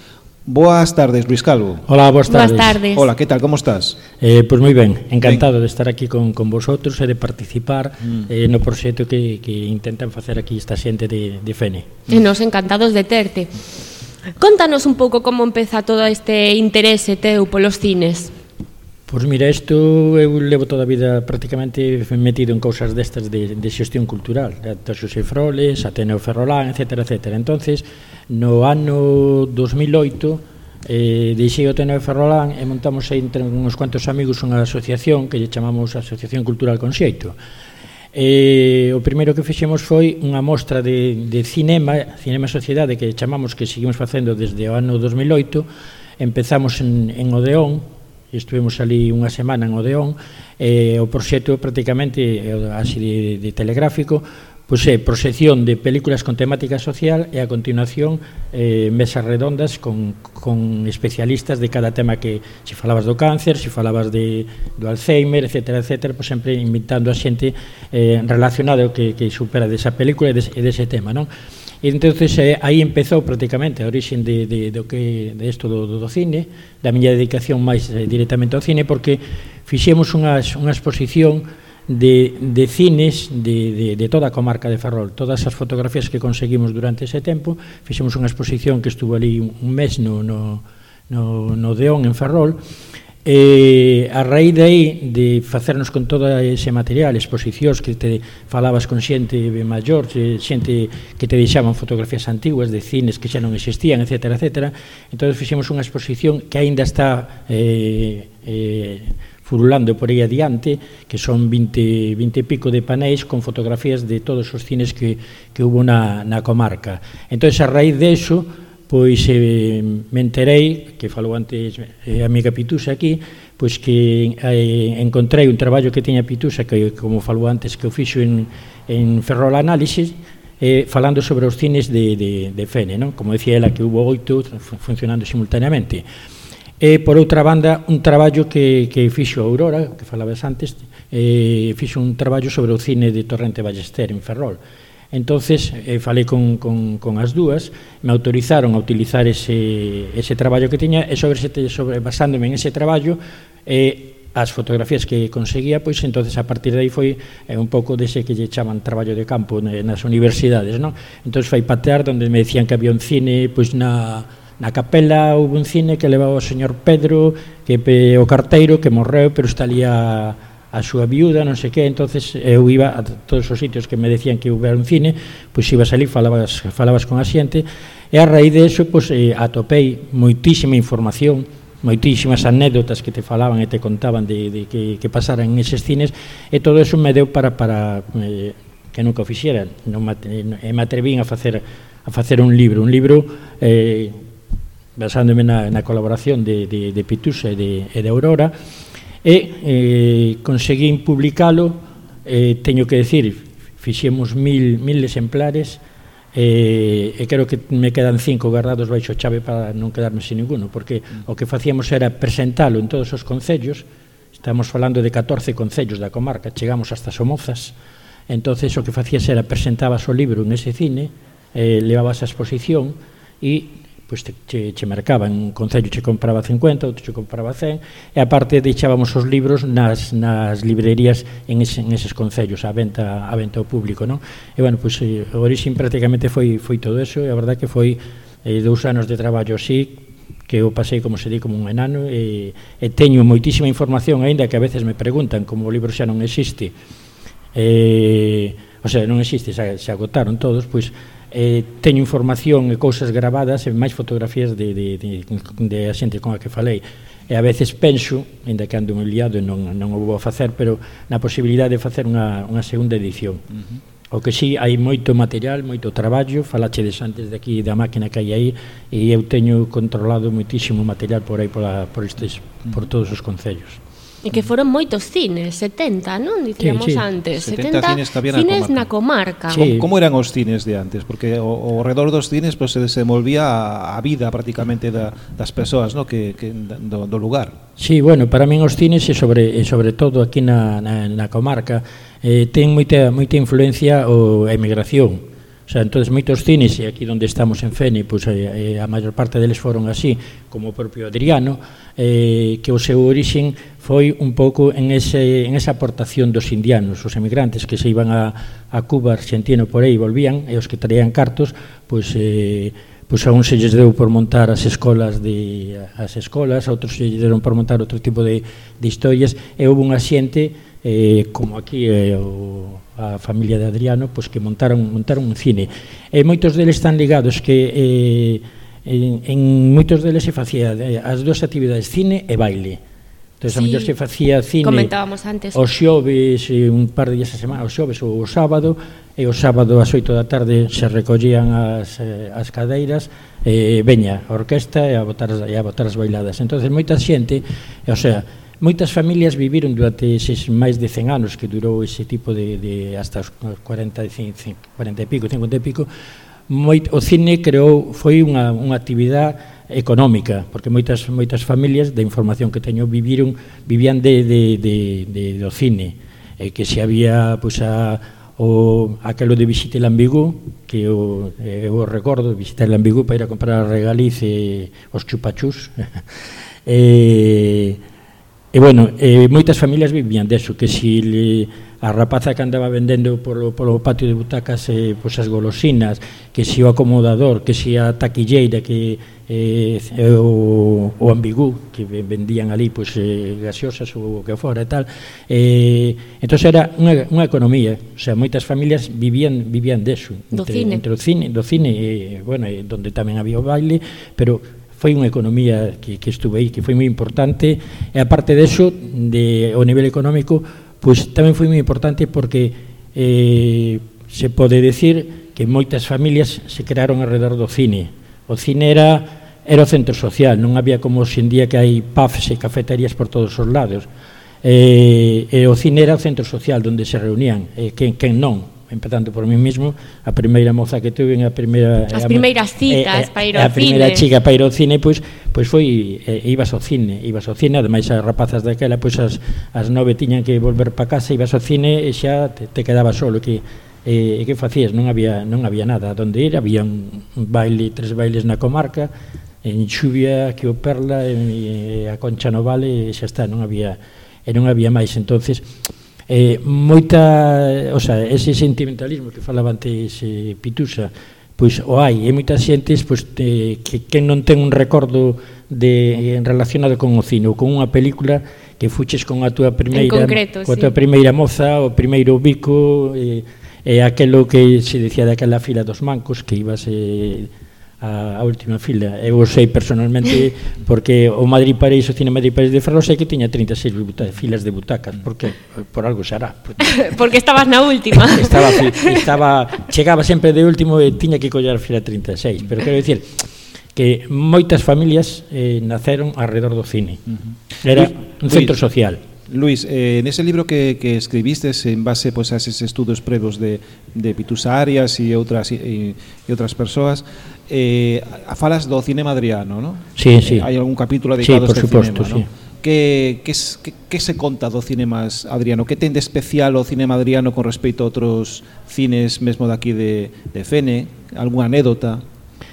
Boas tardes, Luis Calvo. Hola, boas tardes. Boas tardes. Hola, que tal, como estás? Pois moi ben, encantado de estar aquí con vosotros e de participar no proxecto que intentan facer aquí esta xente de Fene. E nos encantados de terte. Contanos un pouco como empeza todo este interese teu polos cines. Pois mira, isto eu levo toda a vida prácticamente metido en cousas destas de xestión cultural, ata Xosé Froles, Ateneo Ferrolán, etcétera, etcétera. Entonces, no ano 2008 deixei o Ateneo Ferrolán e montamos aí entre uns cuantos amigos unha asociación que lle chamamos Asociación Cultural Conxeito. O primeiro que fixemos foi unha mostra de cinema sociedade que chamamos, que seguimos facendo desde o ano 2008. Empezamos en Odeón, estuvemos ali unha semana en Odeón. O proxecto prácticamente así de telegráfico, pois é proxección de películas con temática social e a continuación mesas redondas con especialistas de cada tema, que se falabas do cáncer, se falabas do Alzheimer, etcétera, etcétera, pois sempre invitando a xente relacionada ao que supera desa película e dese tema, non? E entonces aí empezou prácticamente a orixe de isto do cine, da miña dedicación máis directamente ao cine, porque fixemos unha exposición de cines de toda a comarca de Ferrol. Todas as fotografías que conseguimos durante ese tempo, fixemos unha exposición que estuvo ali un mes no Odeón en Ferrol. A raíz de aí, de facernos con todo ese material, exposicións que te falabas con xente maior, xente que te deixaban fotografías antiguas de cines que xa non existían, etcétera, etcétera. Entón fixemos unha exposición que aínda está furulando por aí adiante, que son 20 e pico de panéis con fotografías de todos os cines que hubo na comarca. Entón, a raíz de eso, pois me enterei, que falou antes a amiga Pitusa aquí, pois que encontrei un traballo que tiña Pitusa, que como falou antes, que o fixo en Ferrol Análisis, falando sobre os cines de Fene, non? Como decía ela, que hubo 8 funcionando simultaneamente. E, por outra banda, un traballo que fixo a Aurora, que falabas antes, fixo un traballo sobre o cine de Torrente Ballester en Ferrol. Entonces, falei con as dúas, me autorizaron a utilizar ese traballo que tiña, e basándome en ese traballo, as fotografías que conseguía, pois entonces a partir de aí foi un pouco dese que lle chaman traballo de campo nas universidades, non? Entón foi patear onde me decían que había un cine pois na Na capela houve un cine que levaba o señor Pedro, que o carteiro, que morreu, pero está ali a súa viuda, non sei que. Entonces eu iba a todos os sitios que me decían que houbera un cine, pois ibas ali, falabas con a xente, e a raíz de eso atopei moitísima información, moitísimas anécdotas que te falaban e te contaban de que pasaran en eses cines, e todo eso me deu para que nunca o fixera. E me atrevín a facer un libro basándome na colaboración de Pitusa e de Aurora, e conseguín publicalo. Teño que decir, fixemos 1000 exemplares, e creo que me quedan 5 guardados baixo chave para non quedarme sin ninguno, porque o que facíamos era presentalo en todos os concellos. Estamos falando de 14 concellos da comarca, chegamos hasta Somozas. Entonces o que facías era presentabas o libro nese cine, levabas a exposición e pois che marcaban. Un concello che compraba 50, outro che compraba 100, e aparte deixábamos os libros nas librerías en eses concellos a venta ao público, non? E bueno, pois o orixen prácticamente foi todo eso, e a verdade que foi 2 anos de traballo así, que eu pasei, como se di, como un enano, e teño moitísima información, aínda que a veces me preguntan, como o libro xa non existe, o sea, non existe, se agotaron todos, pois teño información e cousas gravadas e máis fotografías de a xente con a que falei, e a veces penso, ainda que ando moi liado e non o vou a facer, pero na posibilidade de facer unha segunda edición. O que sí, hai moito material, moito traballo, falachedes antes de aquí da máquina que hai aí, e eu teño controlado moitísimo material por aí por todos os concellos. E que foron moitos cines, 70, non? Dicíamos antes, 70 cines que había na comarca. Sí. Como eran os cines de antes? Porque ao redor dos cines se desenvolvía a vida prácticamente das persoas, no? do lugar. Sí, bueno, para min os cines e sobre todo aquí na comarca ten moita influencia a emigración. O sea, entonces moitos cines, e aquí onde estamos en Fene, pois a maior parte deles foron así, como o propio Adriano, que o seu orixen foi un pouco en esa aportación dos indianos, os emigrantes que se iban a Cuba, Argentina, por aí, volvían, e os que traían cartos, pois a uns se lles deu por montar as escolas, a outros se lles deron por montar outro tipo de historias, e houve unha xente, como aquí a familia de Adriano, pois que montaron un cine, e moitos deles están ligados que en moitos deles se facía as dúas actividades, cine e baile. Entón, a mellor se facía cine os xoves, un par de días a semana, os xoves ou o sábado, e o sábado ás 8 da tarde se recollían as cadeiras, veña a orquesta e a botar as bailadas. Entón, moita xente, o sea, moitas familias viviron durante eses máis de 100 anos que durou ese tipo de hasta os 40 e pico, 50 e pico. O cine foi unha actividade económica, porque moitas familias, da información que teño, vivían do cine, que se había aquelo de Visite l'Ambigu, que eu recordo, visitar l'Ambigu para ir a comprar a Regaliz e os chupachús, e bueno, moitas familias vivían deso, que si a rapaza que andaba vendendo polo patio de butacas as golosinas, que si o acomodador, que si a taquilleira, que o ambigú, que vendían ali gaseosas ou o que fora e tal. Entón era unha economía, o sea, moitas familias vivían deso, entre o cine, bueno, donde tamén había o baile, pero foi unha economía que estuve aí, que foi moi importante, e aparte deso, ao nivel económico, pois tamén foi moi importante porque se pode decir que moitas familias se crearon alrededor do cine. O cine era o centro social, non había como hoxe en día que hai pubs e cafeterías por todos os lados. E o cine era o centro social onde se reunían, quen non. Empezando por mí mismo, a primeira moza que tuve, as primeiras citas para ir ao cine, a primeira chica para ir ao cine, pois foi, ibas ao cine, ademais as rapazas daquela, pois as 9 tiñan que volver para casa, ibas ao cine e xa te quedabas solo, que facías? Non había nada onde ir, había un baile, 3 bailes na comarca, en Xuvia, que o Perla, e a Concha no Vale, e xa está, non había máis. Entonces moita, o sea, ese sentimentalismo que falaba antes Pitusa, pois o hai, e moitas xentes pois, que non ten un recordo relacionado con o cine ou con unha película que fuches con a túa primeira tua primeira moza, o primeiro bico, e aquelo que se decía daquela fila dos mancos que ibas a última fila. Eu sei personalmente porque o Madrid París, o Cine Madrid París de Ferrol, sei que tiña 36 filas de butacas. Por que? Por algo xará. Porque estabas na última. Chegaba sempre de último e tiña que coller a fila 36. Pero quero dicir que moitas familias naceron alrededor do cine. Era un centro social. Luis, nese libro que escribistes en base pues, a esos estudos previos de Pitusa Arias e outras persoas, falas do cinema adriano, non? Sí. Hai algún capítulo dedicado a este suposto, cinema, non? Que se conta do cinema adriano? Que ten de especial o cinema adriano con respecto a outros cines mesmo daqui de Fene? Algúna anécdota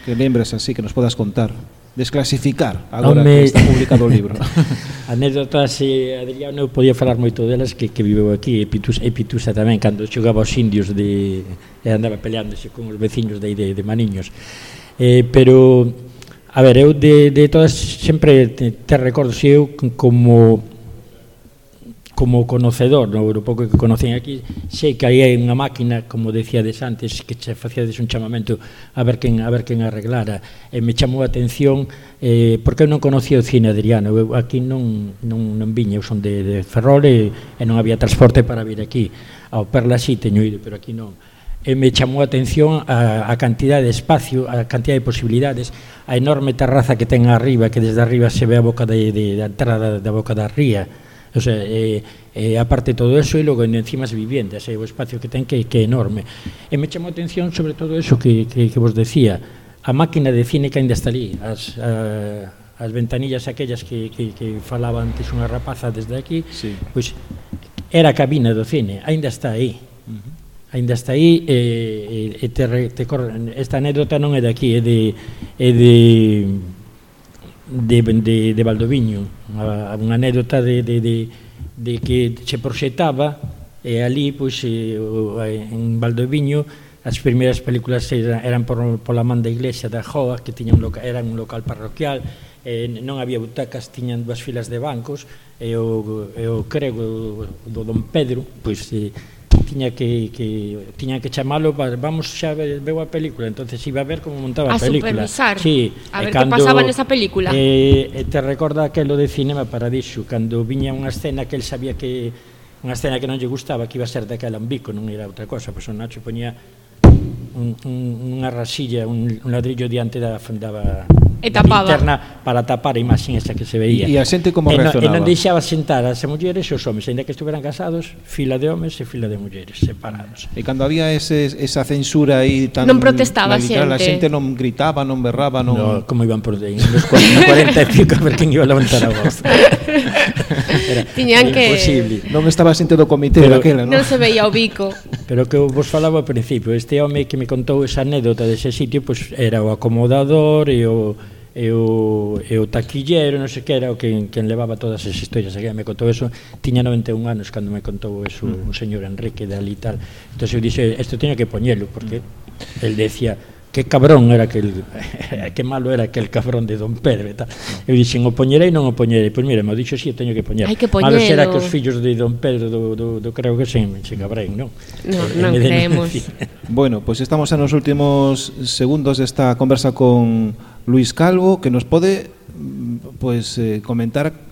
que lembres así que nos podas contar? Desclasificar agora que está publicado o libro. Anécdotas, Adriano, eu podía falar moito delas que viveu aquí, e Pitusa tamén, cando xogaba aos indios e andaba peleándose con os veciños de Maniños. Pero, a ver, eu de todas sempre te recordo, se eu como conocedor, no pouco que conocen aquí, sei que hai unha máquina, como decíades antes, que che facíades un chamamento a ver quen arreglara, e me chamou a atención porque eu non conocía o cine adriano. Eu aquí non viña, eu son de Ferrol e non había transporte para vir aquí. Ao Perla sí teño ido, pero aquí non. E me chamou a atención a cantidad de espacio, a cantidad de posibilidades, a enorme terraza que ten arriba, que desde arriba se ve a boca da entrada da boca da ría. O sea, aparte de todo eso, e logo encima as viviendas, o espacio que ten que é enorme. E me chamou a atención sobre todo eso que vos decía, a máquina de cine que ainda está ali, as ventanillas aquellas que falaba antes unha rapaza desde aquí, pois era a cabina do cine, ainda está aí. Ainda está aí, esta anécdota non é de aquí, é de Valdoviño, unha anécdota de que se proxetaba e ali, pois, en Valdoviño as primeiras películas eran pola man da iglesia da Joa, que era un local parroquial, non había butacas, tiñan dúas filas de bancos, e o crego do Don Pedro, pois, tiña que chamalo para vamos xa veo a película, entonces iba a ver como montaba a película, supervisar, a ver que pasaba nesa película. Te recorda aquelo de Cinema Paradiso, cando viña unha escena que el sabía que unha escena que non lle gustaba, que iba a ser daquela un bico, non era outra cosa, pois o Nacho poñía unha rasilla, un ladrillo diante da linterna para tapar a imaxen esa que se veía. E a xente como reaccionaba? E non deixaba sentar as mulleres e os homes, ainda que estuveran casados, fila de homes e fila de mulleres separados. E cando había esa censura aí tan non protestaba a xente. A xente non gritaba, non berraba, non... No, como iban por aí, nos 45 a ver quen iba a levantar a voz. Tiñan que... Imposible. Non estaba a xente do comité daquela, non? Non se veía o bico. Pero que vos falaba ao principio, este home que me contou esa anécdota dese sitio, pois era o acomodador e o taquillero, non sei que era o que levaba todas as historias. Que me contou eso, tiña 91 anos cando me contou eso o señor Enrique de ali e tal. Entón eu dixe, isto teño que poñelo, porque el decía, que cabrón era que malo era aquel cabrón de Don Pedro e tal. Eu dixen, o poñerei non o poñerei. Pois mira, me dixo, si, teño que poñer. Hai que poñelo. Malo será que os fillos de Don Pedro do creo que se cabrein, non? Non creemos. Bueno, pois estamos nos últimos segundos desta conversa con Luis Calvo, que nos pode comentar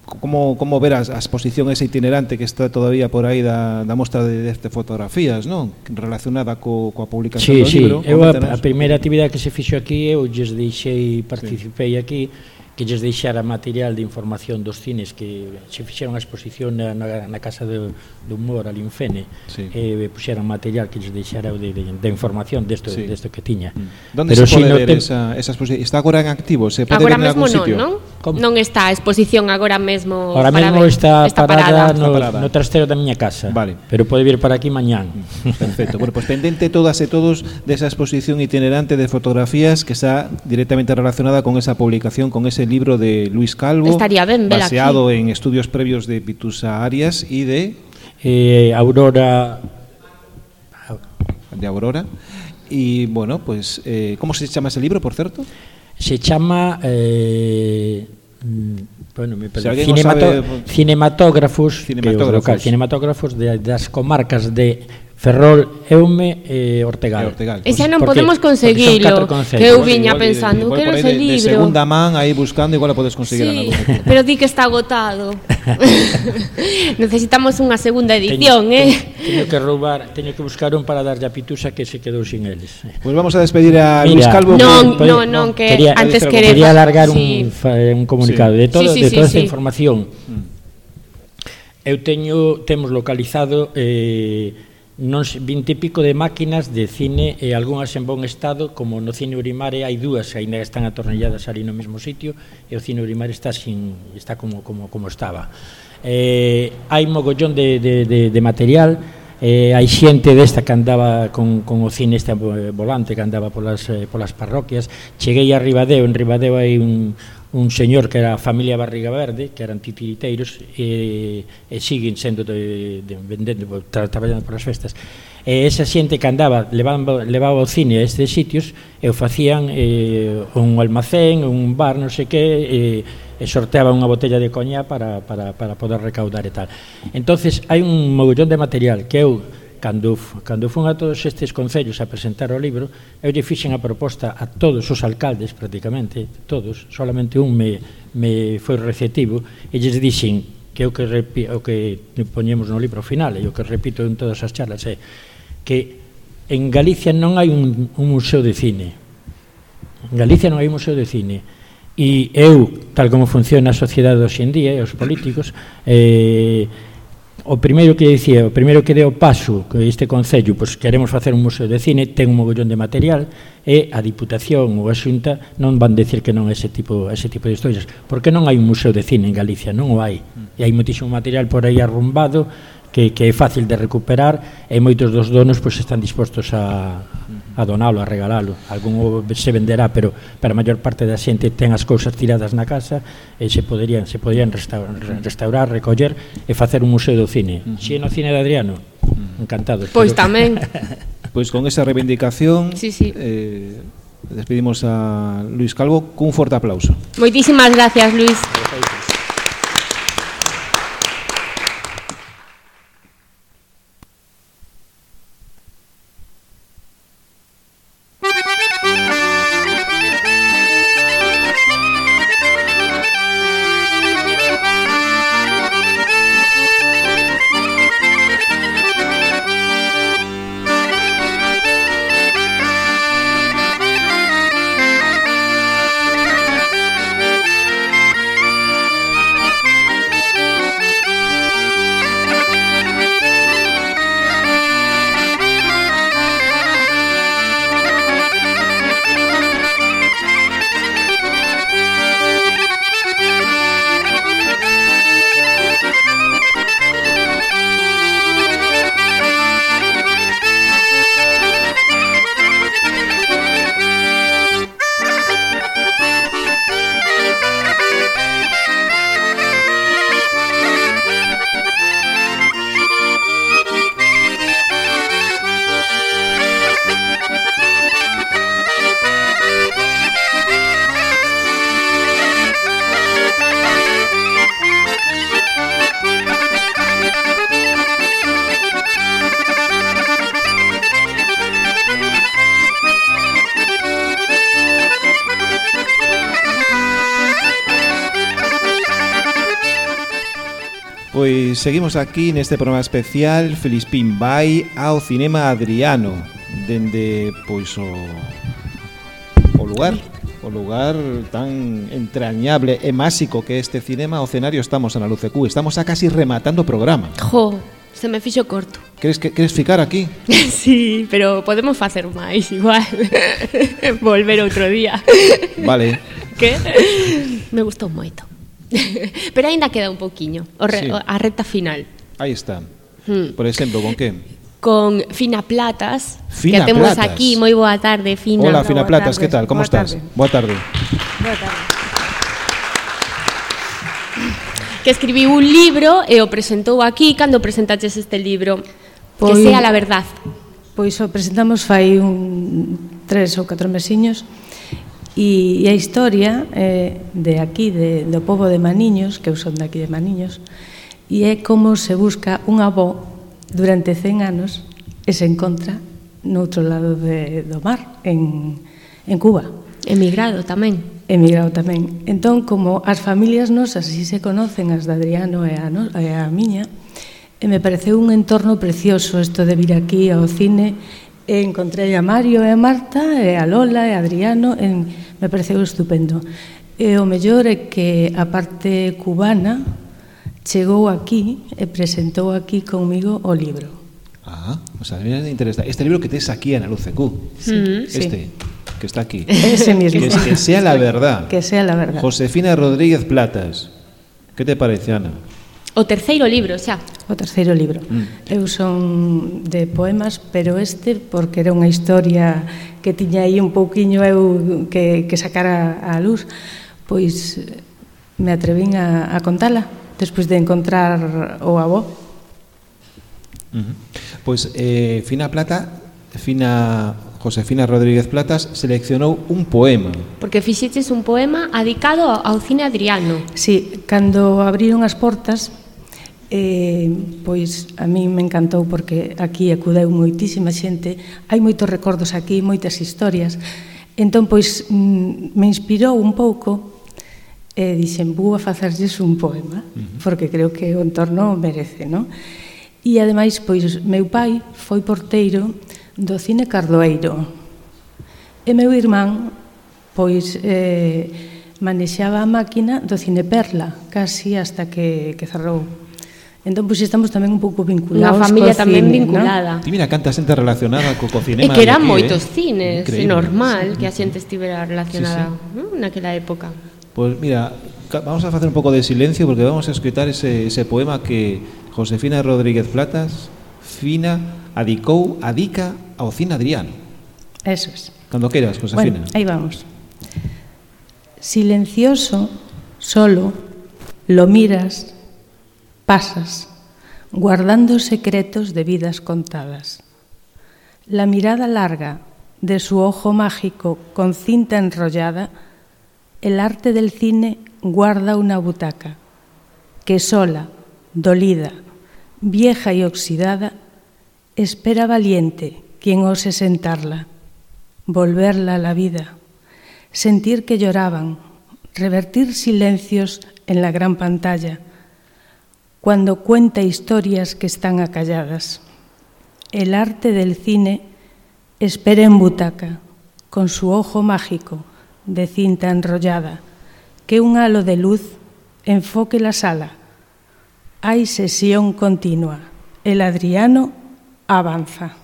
como ver a exposición esa itinerante que está todavía por aí da mostra de fotografías, non? Relacionada coa publicación do libro. Sí, eu a primeira actividade que se fixo aquí, eu lles deixei, participei aquí, que lles deixara material de información dos cines que se fixeron a exposición na Casa do Humor ali en Fene, e puxeran material que lles deixara de información desto que tiña. Onde se pode ver esa exposición? Está agora en activo? Se pode ver en algún sitio? Non está a exposición agora mesmo. Ahora mesmo está parada no trastero da miña casa, pero pode vir para aquí mañán. Perfecto. Bueno, pues pendente todas e todos desa exposición itinerante de fotografías que está directamente relacionada con esa publicación, con ese libro de Luis Calvo, estaría ben ver baseado aquí en estudios previos de Pitusa Arias y de Aurora de Aurora. Y, bueno, pues, ¿cómo se chama ese libro, por certo? Se chama... bueno, cinematógrafos das comarcas de Ferrol, Eume e Ortegal. Ese non podemos conseguilo, que eu viña pensando, quero ese libro. De segunda man, aí buscando, igual o podes conseguir. Sí, pero di que está agotado. Necesitamos unha segunda edición, Teño que buscar un para darlle a Pitusa que se quedou sin eles. Pues vamos a despedir a Luis Calvo. Non, que antes quería alargar un comunicado de toda esta información. Temos localizado non 20 e pico de máquinas de cine e algunhas en bon estado, como no Cine Urimare hai dúas que ainda están atornilladas ali no mesmo sitio, e o Cine Urimare está como estaba. Hai mogollón de material, hai xente desta que andaba con o cine este volante que andaba polas parroquias. Cheguei a Ribadeo, en Ribadeo hai un señor que era a familia Barriga Verde, que eran titiriteiros e siguen sendo vendendo, traballando polas festas. Esa xente que andaba levaba o cine a estes sitios e o facían un almacén, un bar, non sei que, e sorteaban unha botella de coña para poder recaudar e tal. Entonces hai un mogollón de material que eu, cando fun a todos estes concellos a presentar o libro, eu lle fixen a proposta a todos os alcaldes, prácticamente todos, solamente un me foi receptivo, e lles dixen que o que poñemos no libro final, e o que repito en todas as charlas, é que en Galicia non hai un museo de cine. En Galicia non hai un museo de cine. E eu, tal como funciona a sociedade hoxe en día, e os políticos, o primeiro que deu paso que este concello, pois queremos facer un museo de cine, ten un mogollón de material, e a Diputación ou a Xunta non van decir que non é ese tipo de historias, porque non hai un museo de cine en Galicia, non o hai, e hai moitísimo material por aí arrumbado que é fácil de recuperar, e moitos dos donos pois están dispostos a donalo, a regalalo. Algún se venderá, pero a maior parte da xente ten as cousas tiradas na casa e se poderían restaurar, recoller e facer un museo do cine. Si no cine de Adriano, encantados. Pois tamén. Pois con esa reivindicación despedimos a Luis Calvo cun forte aplauso. Moitísimas gracias, Luis. Pois seguimos aquí neste programa especial Filispín vai ao Cinema Adriano, dende pois o lugar tan entrañable e máxico que este cinema, o escenario. Estamos na LUCQ, estamos a casi rematando o programa. Jo, se me fixo corto. Queres ficar aquí? Sí, pero podemos facer máis igual. Volver outro día. Vale. Que? Me gustou moito. Pero aínda queda un poquiño a recta final. Aí está. Por exemplo, con que? Con Fina Platas, Fina que temos Platas. aquí. Moi boa tarde, Fina. Hola, Fina Platas, que tal? Como estás? Boa tarde. Boa tarde. Que escribiu un libro e o presentou aquí. Cando presentaches este libro? Que sea la verdad. Pois o presentamos fai 3 ou 4 mesiños e a historia de aquí, do pobo de Maniños, que eu son de aquí de Maniños, e é como se busca un avó durante 100 anos e se encontra no outro lado do mar, en Cuba. Emigrado tamén. Entón, como as familias nosas así se conocen, as de Adriano e a miña, me pareceu un entorno precioso isto de vir aquí ao cine. Encontrei a Mario e a Marta e a Lola e a Adriano, me pareceu estupendo. E o mellor é que a parte cubana chegou aquí e presentou aquí comigo o libro. O sea, me interesa. Este libro que tes aquí en Aluceq. Sí. Que está aquí. Ese mismo. Que sea la verdad. Que sea la verdad. Josefina Rodríguez Platas. ¿Qué te parece, Ana? O terceiro libro, xa. O terceiro libro. Eu son de poemas, pero porque era unha historia que tiña aí un pouquiño eu que sacar a luz, pois me atrevín a contala despois de encontrar o avó. Pois Josefina Rodríguez Platas seleccionou un poema. Porque fixeches un poema adicado ao cine Adriano. Sí, cando abriron as portas, pois a mí me encantou porque aquí acudeu moitísima xente, hai moitos recordos aquí, moitas historias. Entón, pois, me inspirou un pouco e dixen, vou a facerlles un poema, porque creo que o entorno merece, non? E ademais, pois, meu pai foi porteiro do cine Cardoeiro e meu irmán, pois, manexaba a máquina do cine Perla, casi hasta que cerrou. Entón, pois, estamos tamén un pouco vinculados unha familia tamén vinculada. Ti mira, canta xente relacionada co cinema. E que eran moitos cines, é normal que a xente estivera relacionada naquela época. Pois mira, vamos a facer un pouco de silencio porque vamos a escutar ese poema que Josefina Rodríguez Platas adica ao cine Adriano. Eso es. Cando queras, Josefina. Bueno, aí vamos. Silencioso, solo, lo miras, pasas, guardando secretos de vidas contadas. La mirada larga de su ojo mágico con cinta enrollada, el arte del cine guarda una butaca que sola, dolida, vieja y oxidada, espera valiente quien ose sentarla, volverla a la vida, sentir que lloraban, revertir silencios en la gran pantalla, cuando cuenta historias que están acalladas. El arte del cine espera en butaca, con su ojo mágico de cinta enrollada, que un halo de luz enfoque la sala. Hay sesión continua. El Adriano avanza.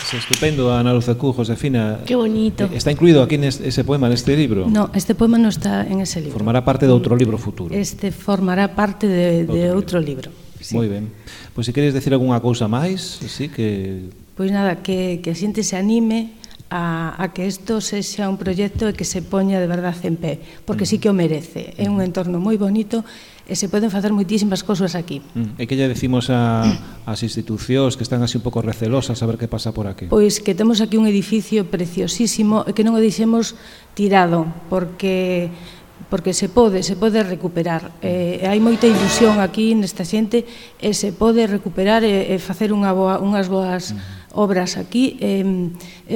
Es estupendo, Ana Aluceq, Josefina. Qué bonito. ¿Está incluido aquí en ese poema, en este libro? No, este poema no está en ese libro. Formará parte de outro libro futuro. Este formará parte de outro libro. Sí. Moi ben. Pois se queres decir algunha cousa máis, así que... Pois nada, que a xente se anime a que isto sexa un proxecto e que se poña de verdade en pé, porque sí que o merece. É un entorno moi bonito e se poden facer moitísimas cousas aquí. E que lle decimos ás institucións que están así un pouco recelosas a ver que pasa por aquí? Pois que temos aquí un edificio preciosísimo e que non o deixemos tirado, porque se pode recuperar. Hai moita ilusión aquí nesta xente e se pode recuperar e facer unhas boas obras aquí e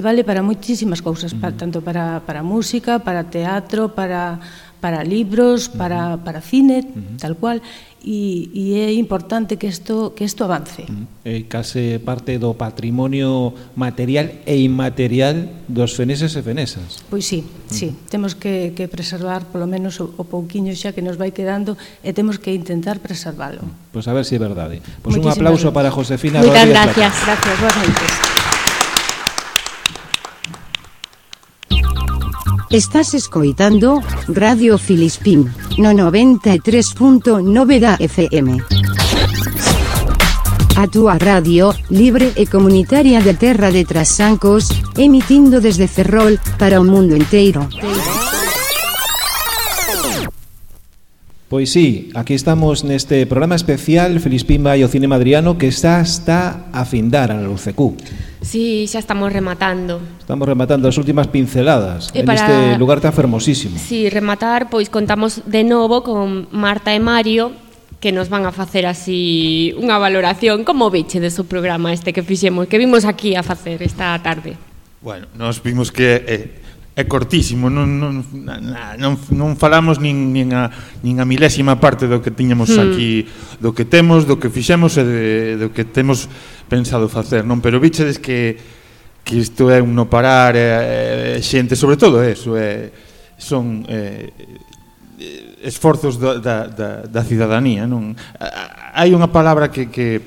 vale para moitísimas cousas, tanto para música, para teatro, para libros, para cine, tal cual, e é importante que isto avance. É case parte do patrimonio material e inmaterial dos feneses e fenesas. Pois sí, temos que preservar polo menos o pouquiño xa que nos vai quedando e temos que intentar preservalo. Pois a ver se é verdade. Pois un aplauso para Josefina Rodríguez. Moitas gracias. Gracias, boas noites. Estás escoitando Radio Filispín no 93.9 da FM. A túa radio, libre e comunitaria de Terra de Trasancos, emitindo desde Ferrol para o mundo inteiro. Pois sí, aquí estamos neste programa especial Feliz Pimba e o Cinema Adriano que está a findar a UCQ. Sí, xa estamos rematando. Estamos rematando as últimas pinceladas en este lugar tan fermosísimo. Sí, rematar, pois contamos de novo con Marta e Mario que nos van a facer así unha valoración. Como viche de seu programa este que fixemos, que vimos aquí a facer esta tarde? Bueno, nos vimos que é cortísimo, non falamos nin a milésima parte do que tiñamos aquí, do que temos, do que fixemos e do que temos pensado facer, non? Pero vichedes que isto é un no parar, xente, sobre todo eso, son esforzos da cidadanía, non? Hai unha palabra que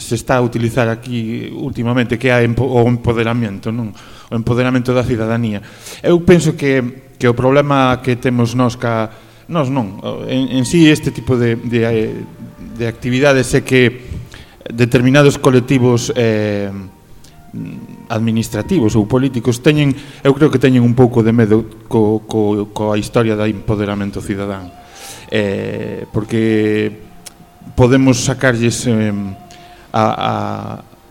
se está a utilizar aquí últimamente, que é o empoderamento, non? O empoderamento da cidadanía. Eu penso que o problema que temos nós en sí este tipo de actividades é que determinados colectivos administrativos ou políticos eu creo que teñen un pouco de medo coa historia do empoderamento cidadán, porque podemos sacarlles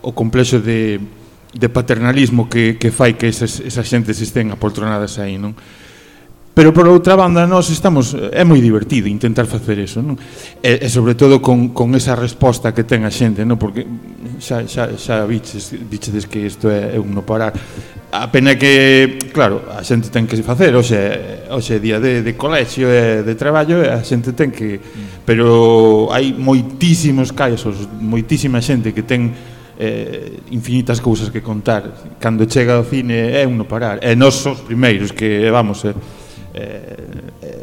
o complexo de paternalismo que fai que esas xentes estén apoltronadas aí, non? Pero por outra banda é moi divertido intentar facer eso, non? E sobre todo con esa resposta que ten a xente, non? Porque xa bichedes que isto é un no parar. A pena que, claro, a xente ten que facer, hoxe é día de colexio e de traballo, e a xente ten que... Pero hai moitísimos casos, moitísima xente que ten infinitas cousas que contar. Cando chega ao cine é un no parar. E nós os primeiros que, vamos,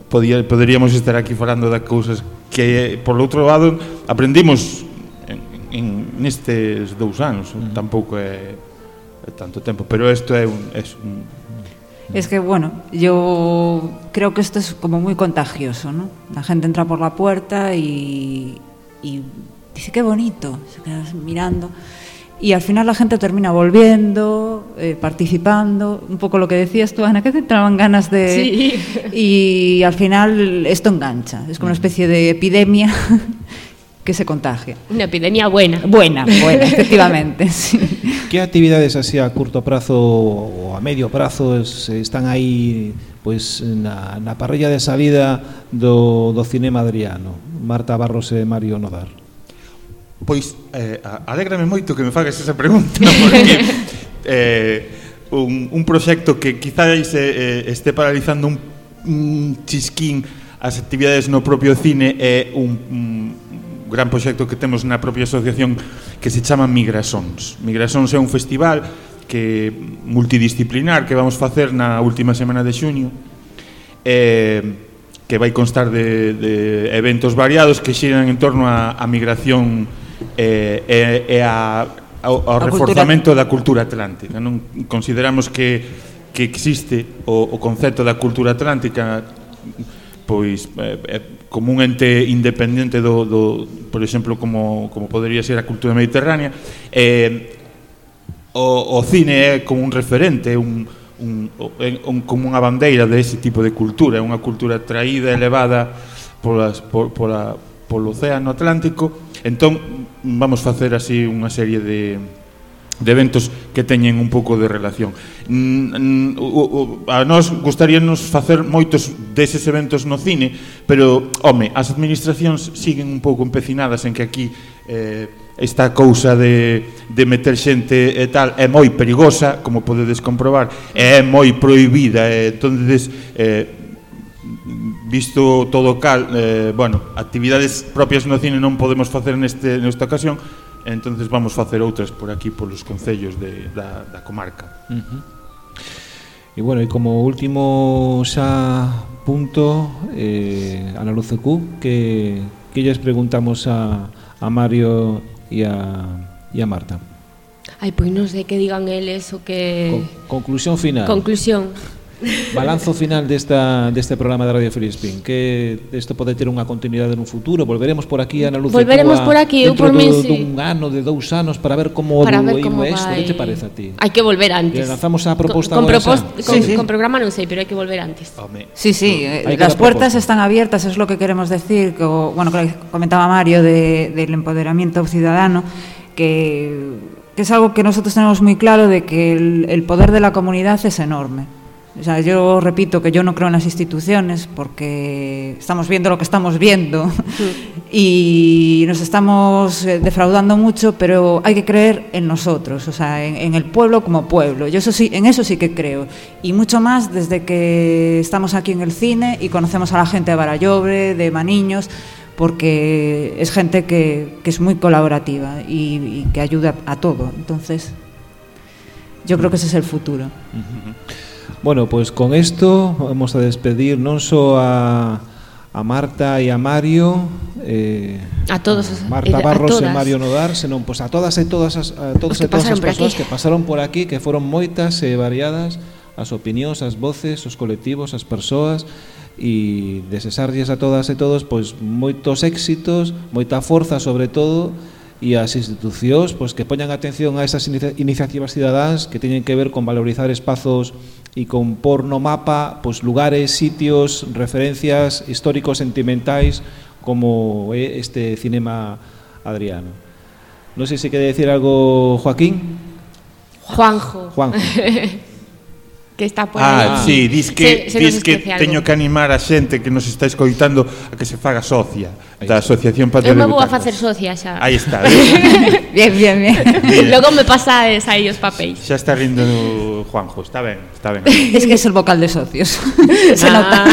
poderíamos estar aquí falando de cousas que, por outro lado, aprendimos nestes 2 anos. Tampouco é tanto tempo, pero isto é un... Es que, bueno, yo creo que esto es como muy contagioso, ¿no? La gente entra por la puerta y dice, qué bonito, se queda mirando. Y al final la gente termina volviendo, participando, un poco lo que decías tú, Ana, que te entraban ganas de... Sí. Y al final esto engancha, es como una especie de epidemia que se contagia. Una epidemia buena. Buena, efectivamente, sí. Que actividades así a curto prazo ou a medio prazo están aí pois na parrilla desa vida do Cinema Adriano? Marta Barros e Mario Nodar. Pois, alégrame moito que me fagas esa pregunta, porque un proxecto que quizáis este paralizando un chisquín as actividades no propio cine é un gran proxecto que temos na propia asociación que se chama Migrasons. Migrasons é un festival multidisciplinar que vamos facer na última semana de xuño, que vai constar de eventos variados que xiran en torno á migración e ao reforzamento da cultura atlántica. Non consideramos que existe o concepto da cultura atlántica pois como un ente independente por exemplo, como podería ser a cultura mediterránea. O cine é como un referente, como unha bandeira dese tipo de cultura, é unha cultura traída, elevada polo océano Atlántico. Entón vamos facer así unha serie de eventos que teñen un pouco de relación. A nós gustaríanos facer moitos deses eventos no cine, pero, home, as administracións siguen un pouco empecinadas en que aquí esta cousa de meter xente e tal é moi perigosa, como podedes comprobar, é moi prohibida, entonces visto todo cal, bueno, actividades propias no cine non podemos facer nesta ocasión. Entonces vamos facer outras por aquí, polos concellos da comarca. E bueno, e como último xa punto, Ana UCQ, que lles preguntamos a Mario e a Marta? Ai, pois non sei que digan eles o que... Conclusión final. Conclusión. Balanzo final deste programa de Radio Filispín, que isto pode ter unha continuidade nun futuro. Volveremos por aquí, Ana Luz, volveremos por aquí, dentro por min, dun ano, de 2 anos, para ver como evolúe isto. Que te parece a ti? Hai que volver antes. Lanzamos a proposta con programa non sei, pero hai que volver antes. Sí, las puertas están abiertas, es lo que queremos decir, que comentaba Mario del empoderamiento ciudadano, que es algo que nosotros tenemos muy claro, de que el poder de la comunidad es enorme. O sea, yo repito que yo no creo en las instituciones porque estamos viendo lo que estamos viendo y nos estamos defraudando mucho, pero hay que creer en nosotros, o sea, en el pueblo como pueblo. Yo en eso sí que creo, y mucho más desde que estamos aquí en el cine y conocemos a la gente de Barallobre, de Maniños, porque es gente que es muy colaborativa y que ayuda a todo. Entonces, yo creo que ese es el futuro. Bueno, pues con esto vamos a despedir non só a Marta e a Mario, a todos, Marta Barros e Mario Nodar, senón pues a todas as persoas que pasaron por aquí, que foron moitas e variadas, as opinións, as voces, os colectivos, as persoas, e desexarlles a todas e todos pois moitos éxitos, moita forza sobre todo, e as institucións pois que poñan atención a esas iniciativas cidadáns que teñen que ver con valorizar espazos e con por no mapa pois lugares, sitios, referencias históricos, sentimentais, como é este cinema adriano. Non sei se quere decir algo Joaquín. Juanjo. Que está por aí. Sí, dis que teño que animar a xente que nos está escoitando a que se faga socia da Asociación Patio de Butacas. Eu me vou a facer socia xa. Aí está. Bien. Logo me pasades aí os papéis. Xa está rindo Juanjo, está ben. Es que es el vocal de socios. Se nota.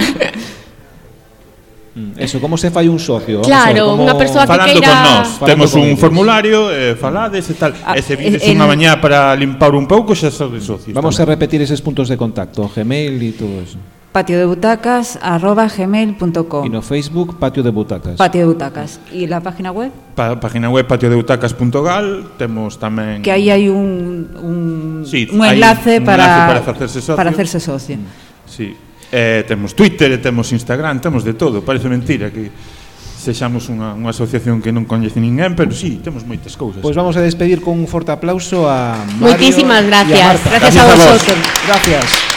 Eso, como se fai un socio? Claro, unha persoa que falando queira... con nós, temos un formulario, falades e tal, e se vides unha mañá para limpar un pouco, xa sodes socios. Vamos a repetir eses puntos de contacto, Gmail e todo eso. patiodebutacas@gmail.com. Y no Facebook, Patio de Butacas. Patio de Butacas. ¿Y la página web? Página web patiodebutacas.gal. Temos tamén... Que aí hai un enlace para hacerse socio. Sí. Temos Twitter e temos Instagram, temos de todo. Parece mentira que sexamos unha asociación que non coñece ninguén, pero sí, temos moitas cousas. Pois vamos a despedir con un forte aplauso a Mario. Moitísimas gracias. Gracias a vosotros. Gracias.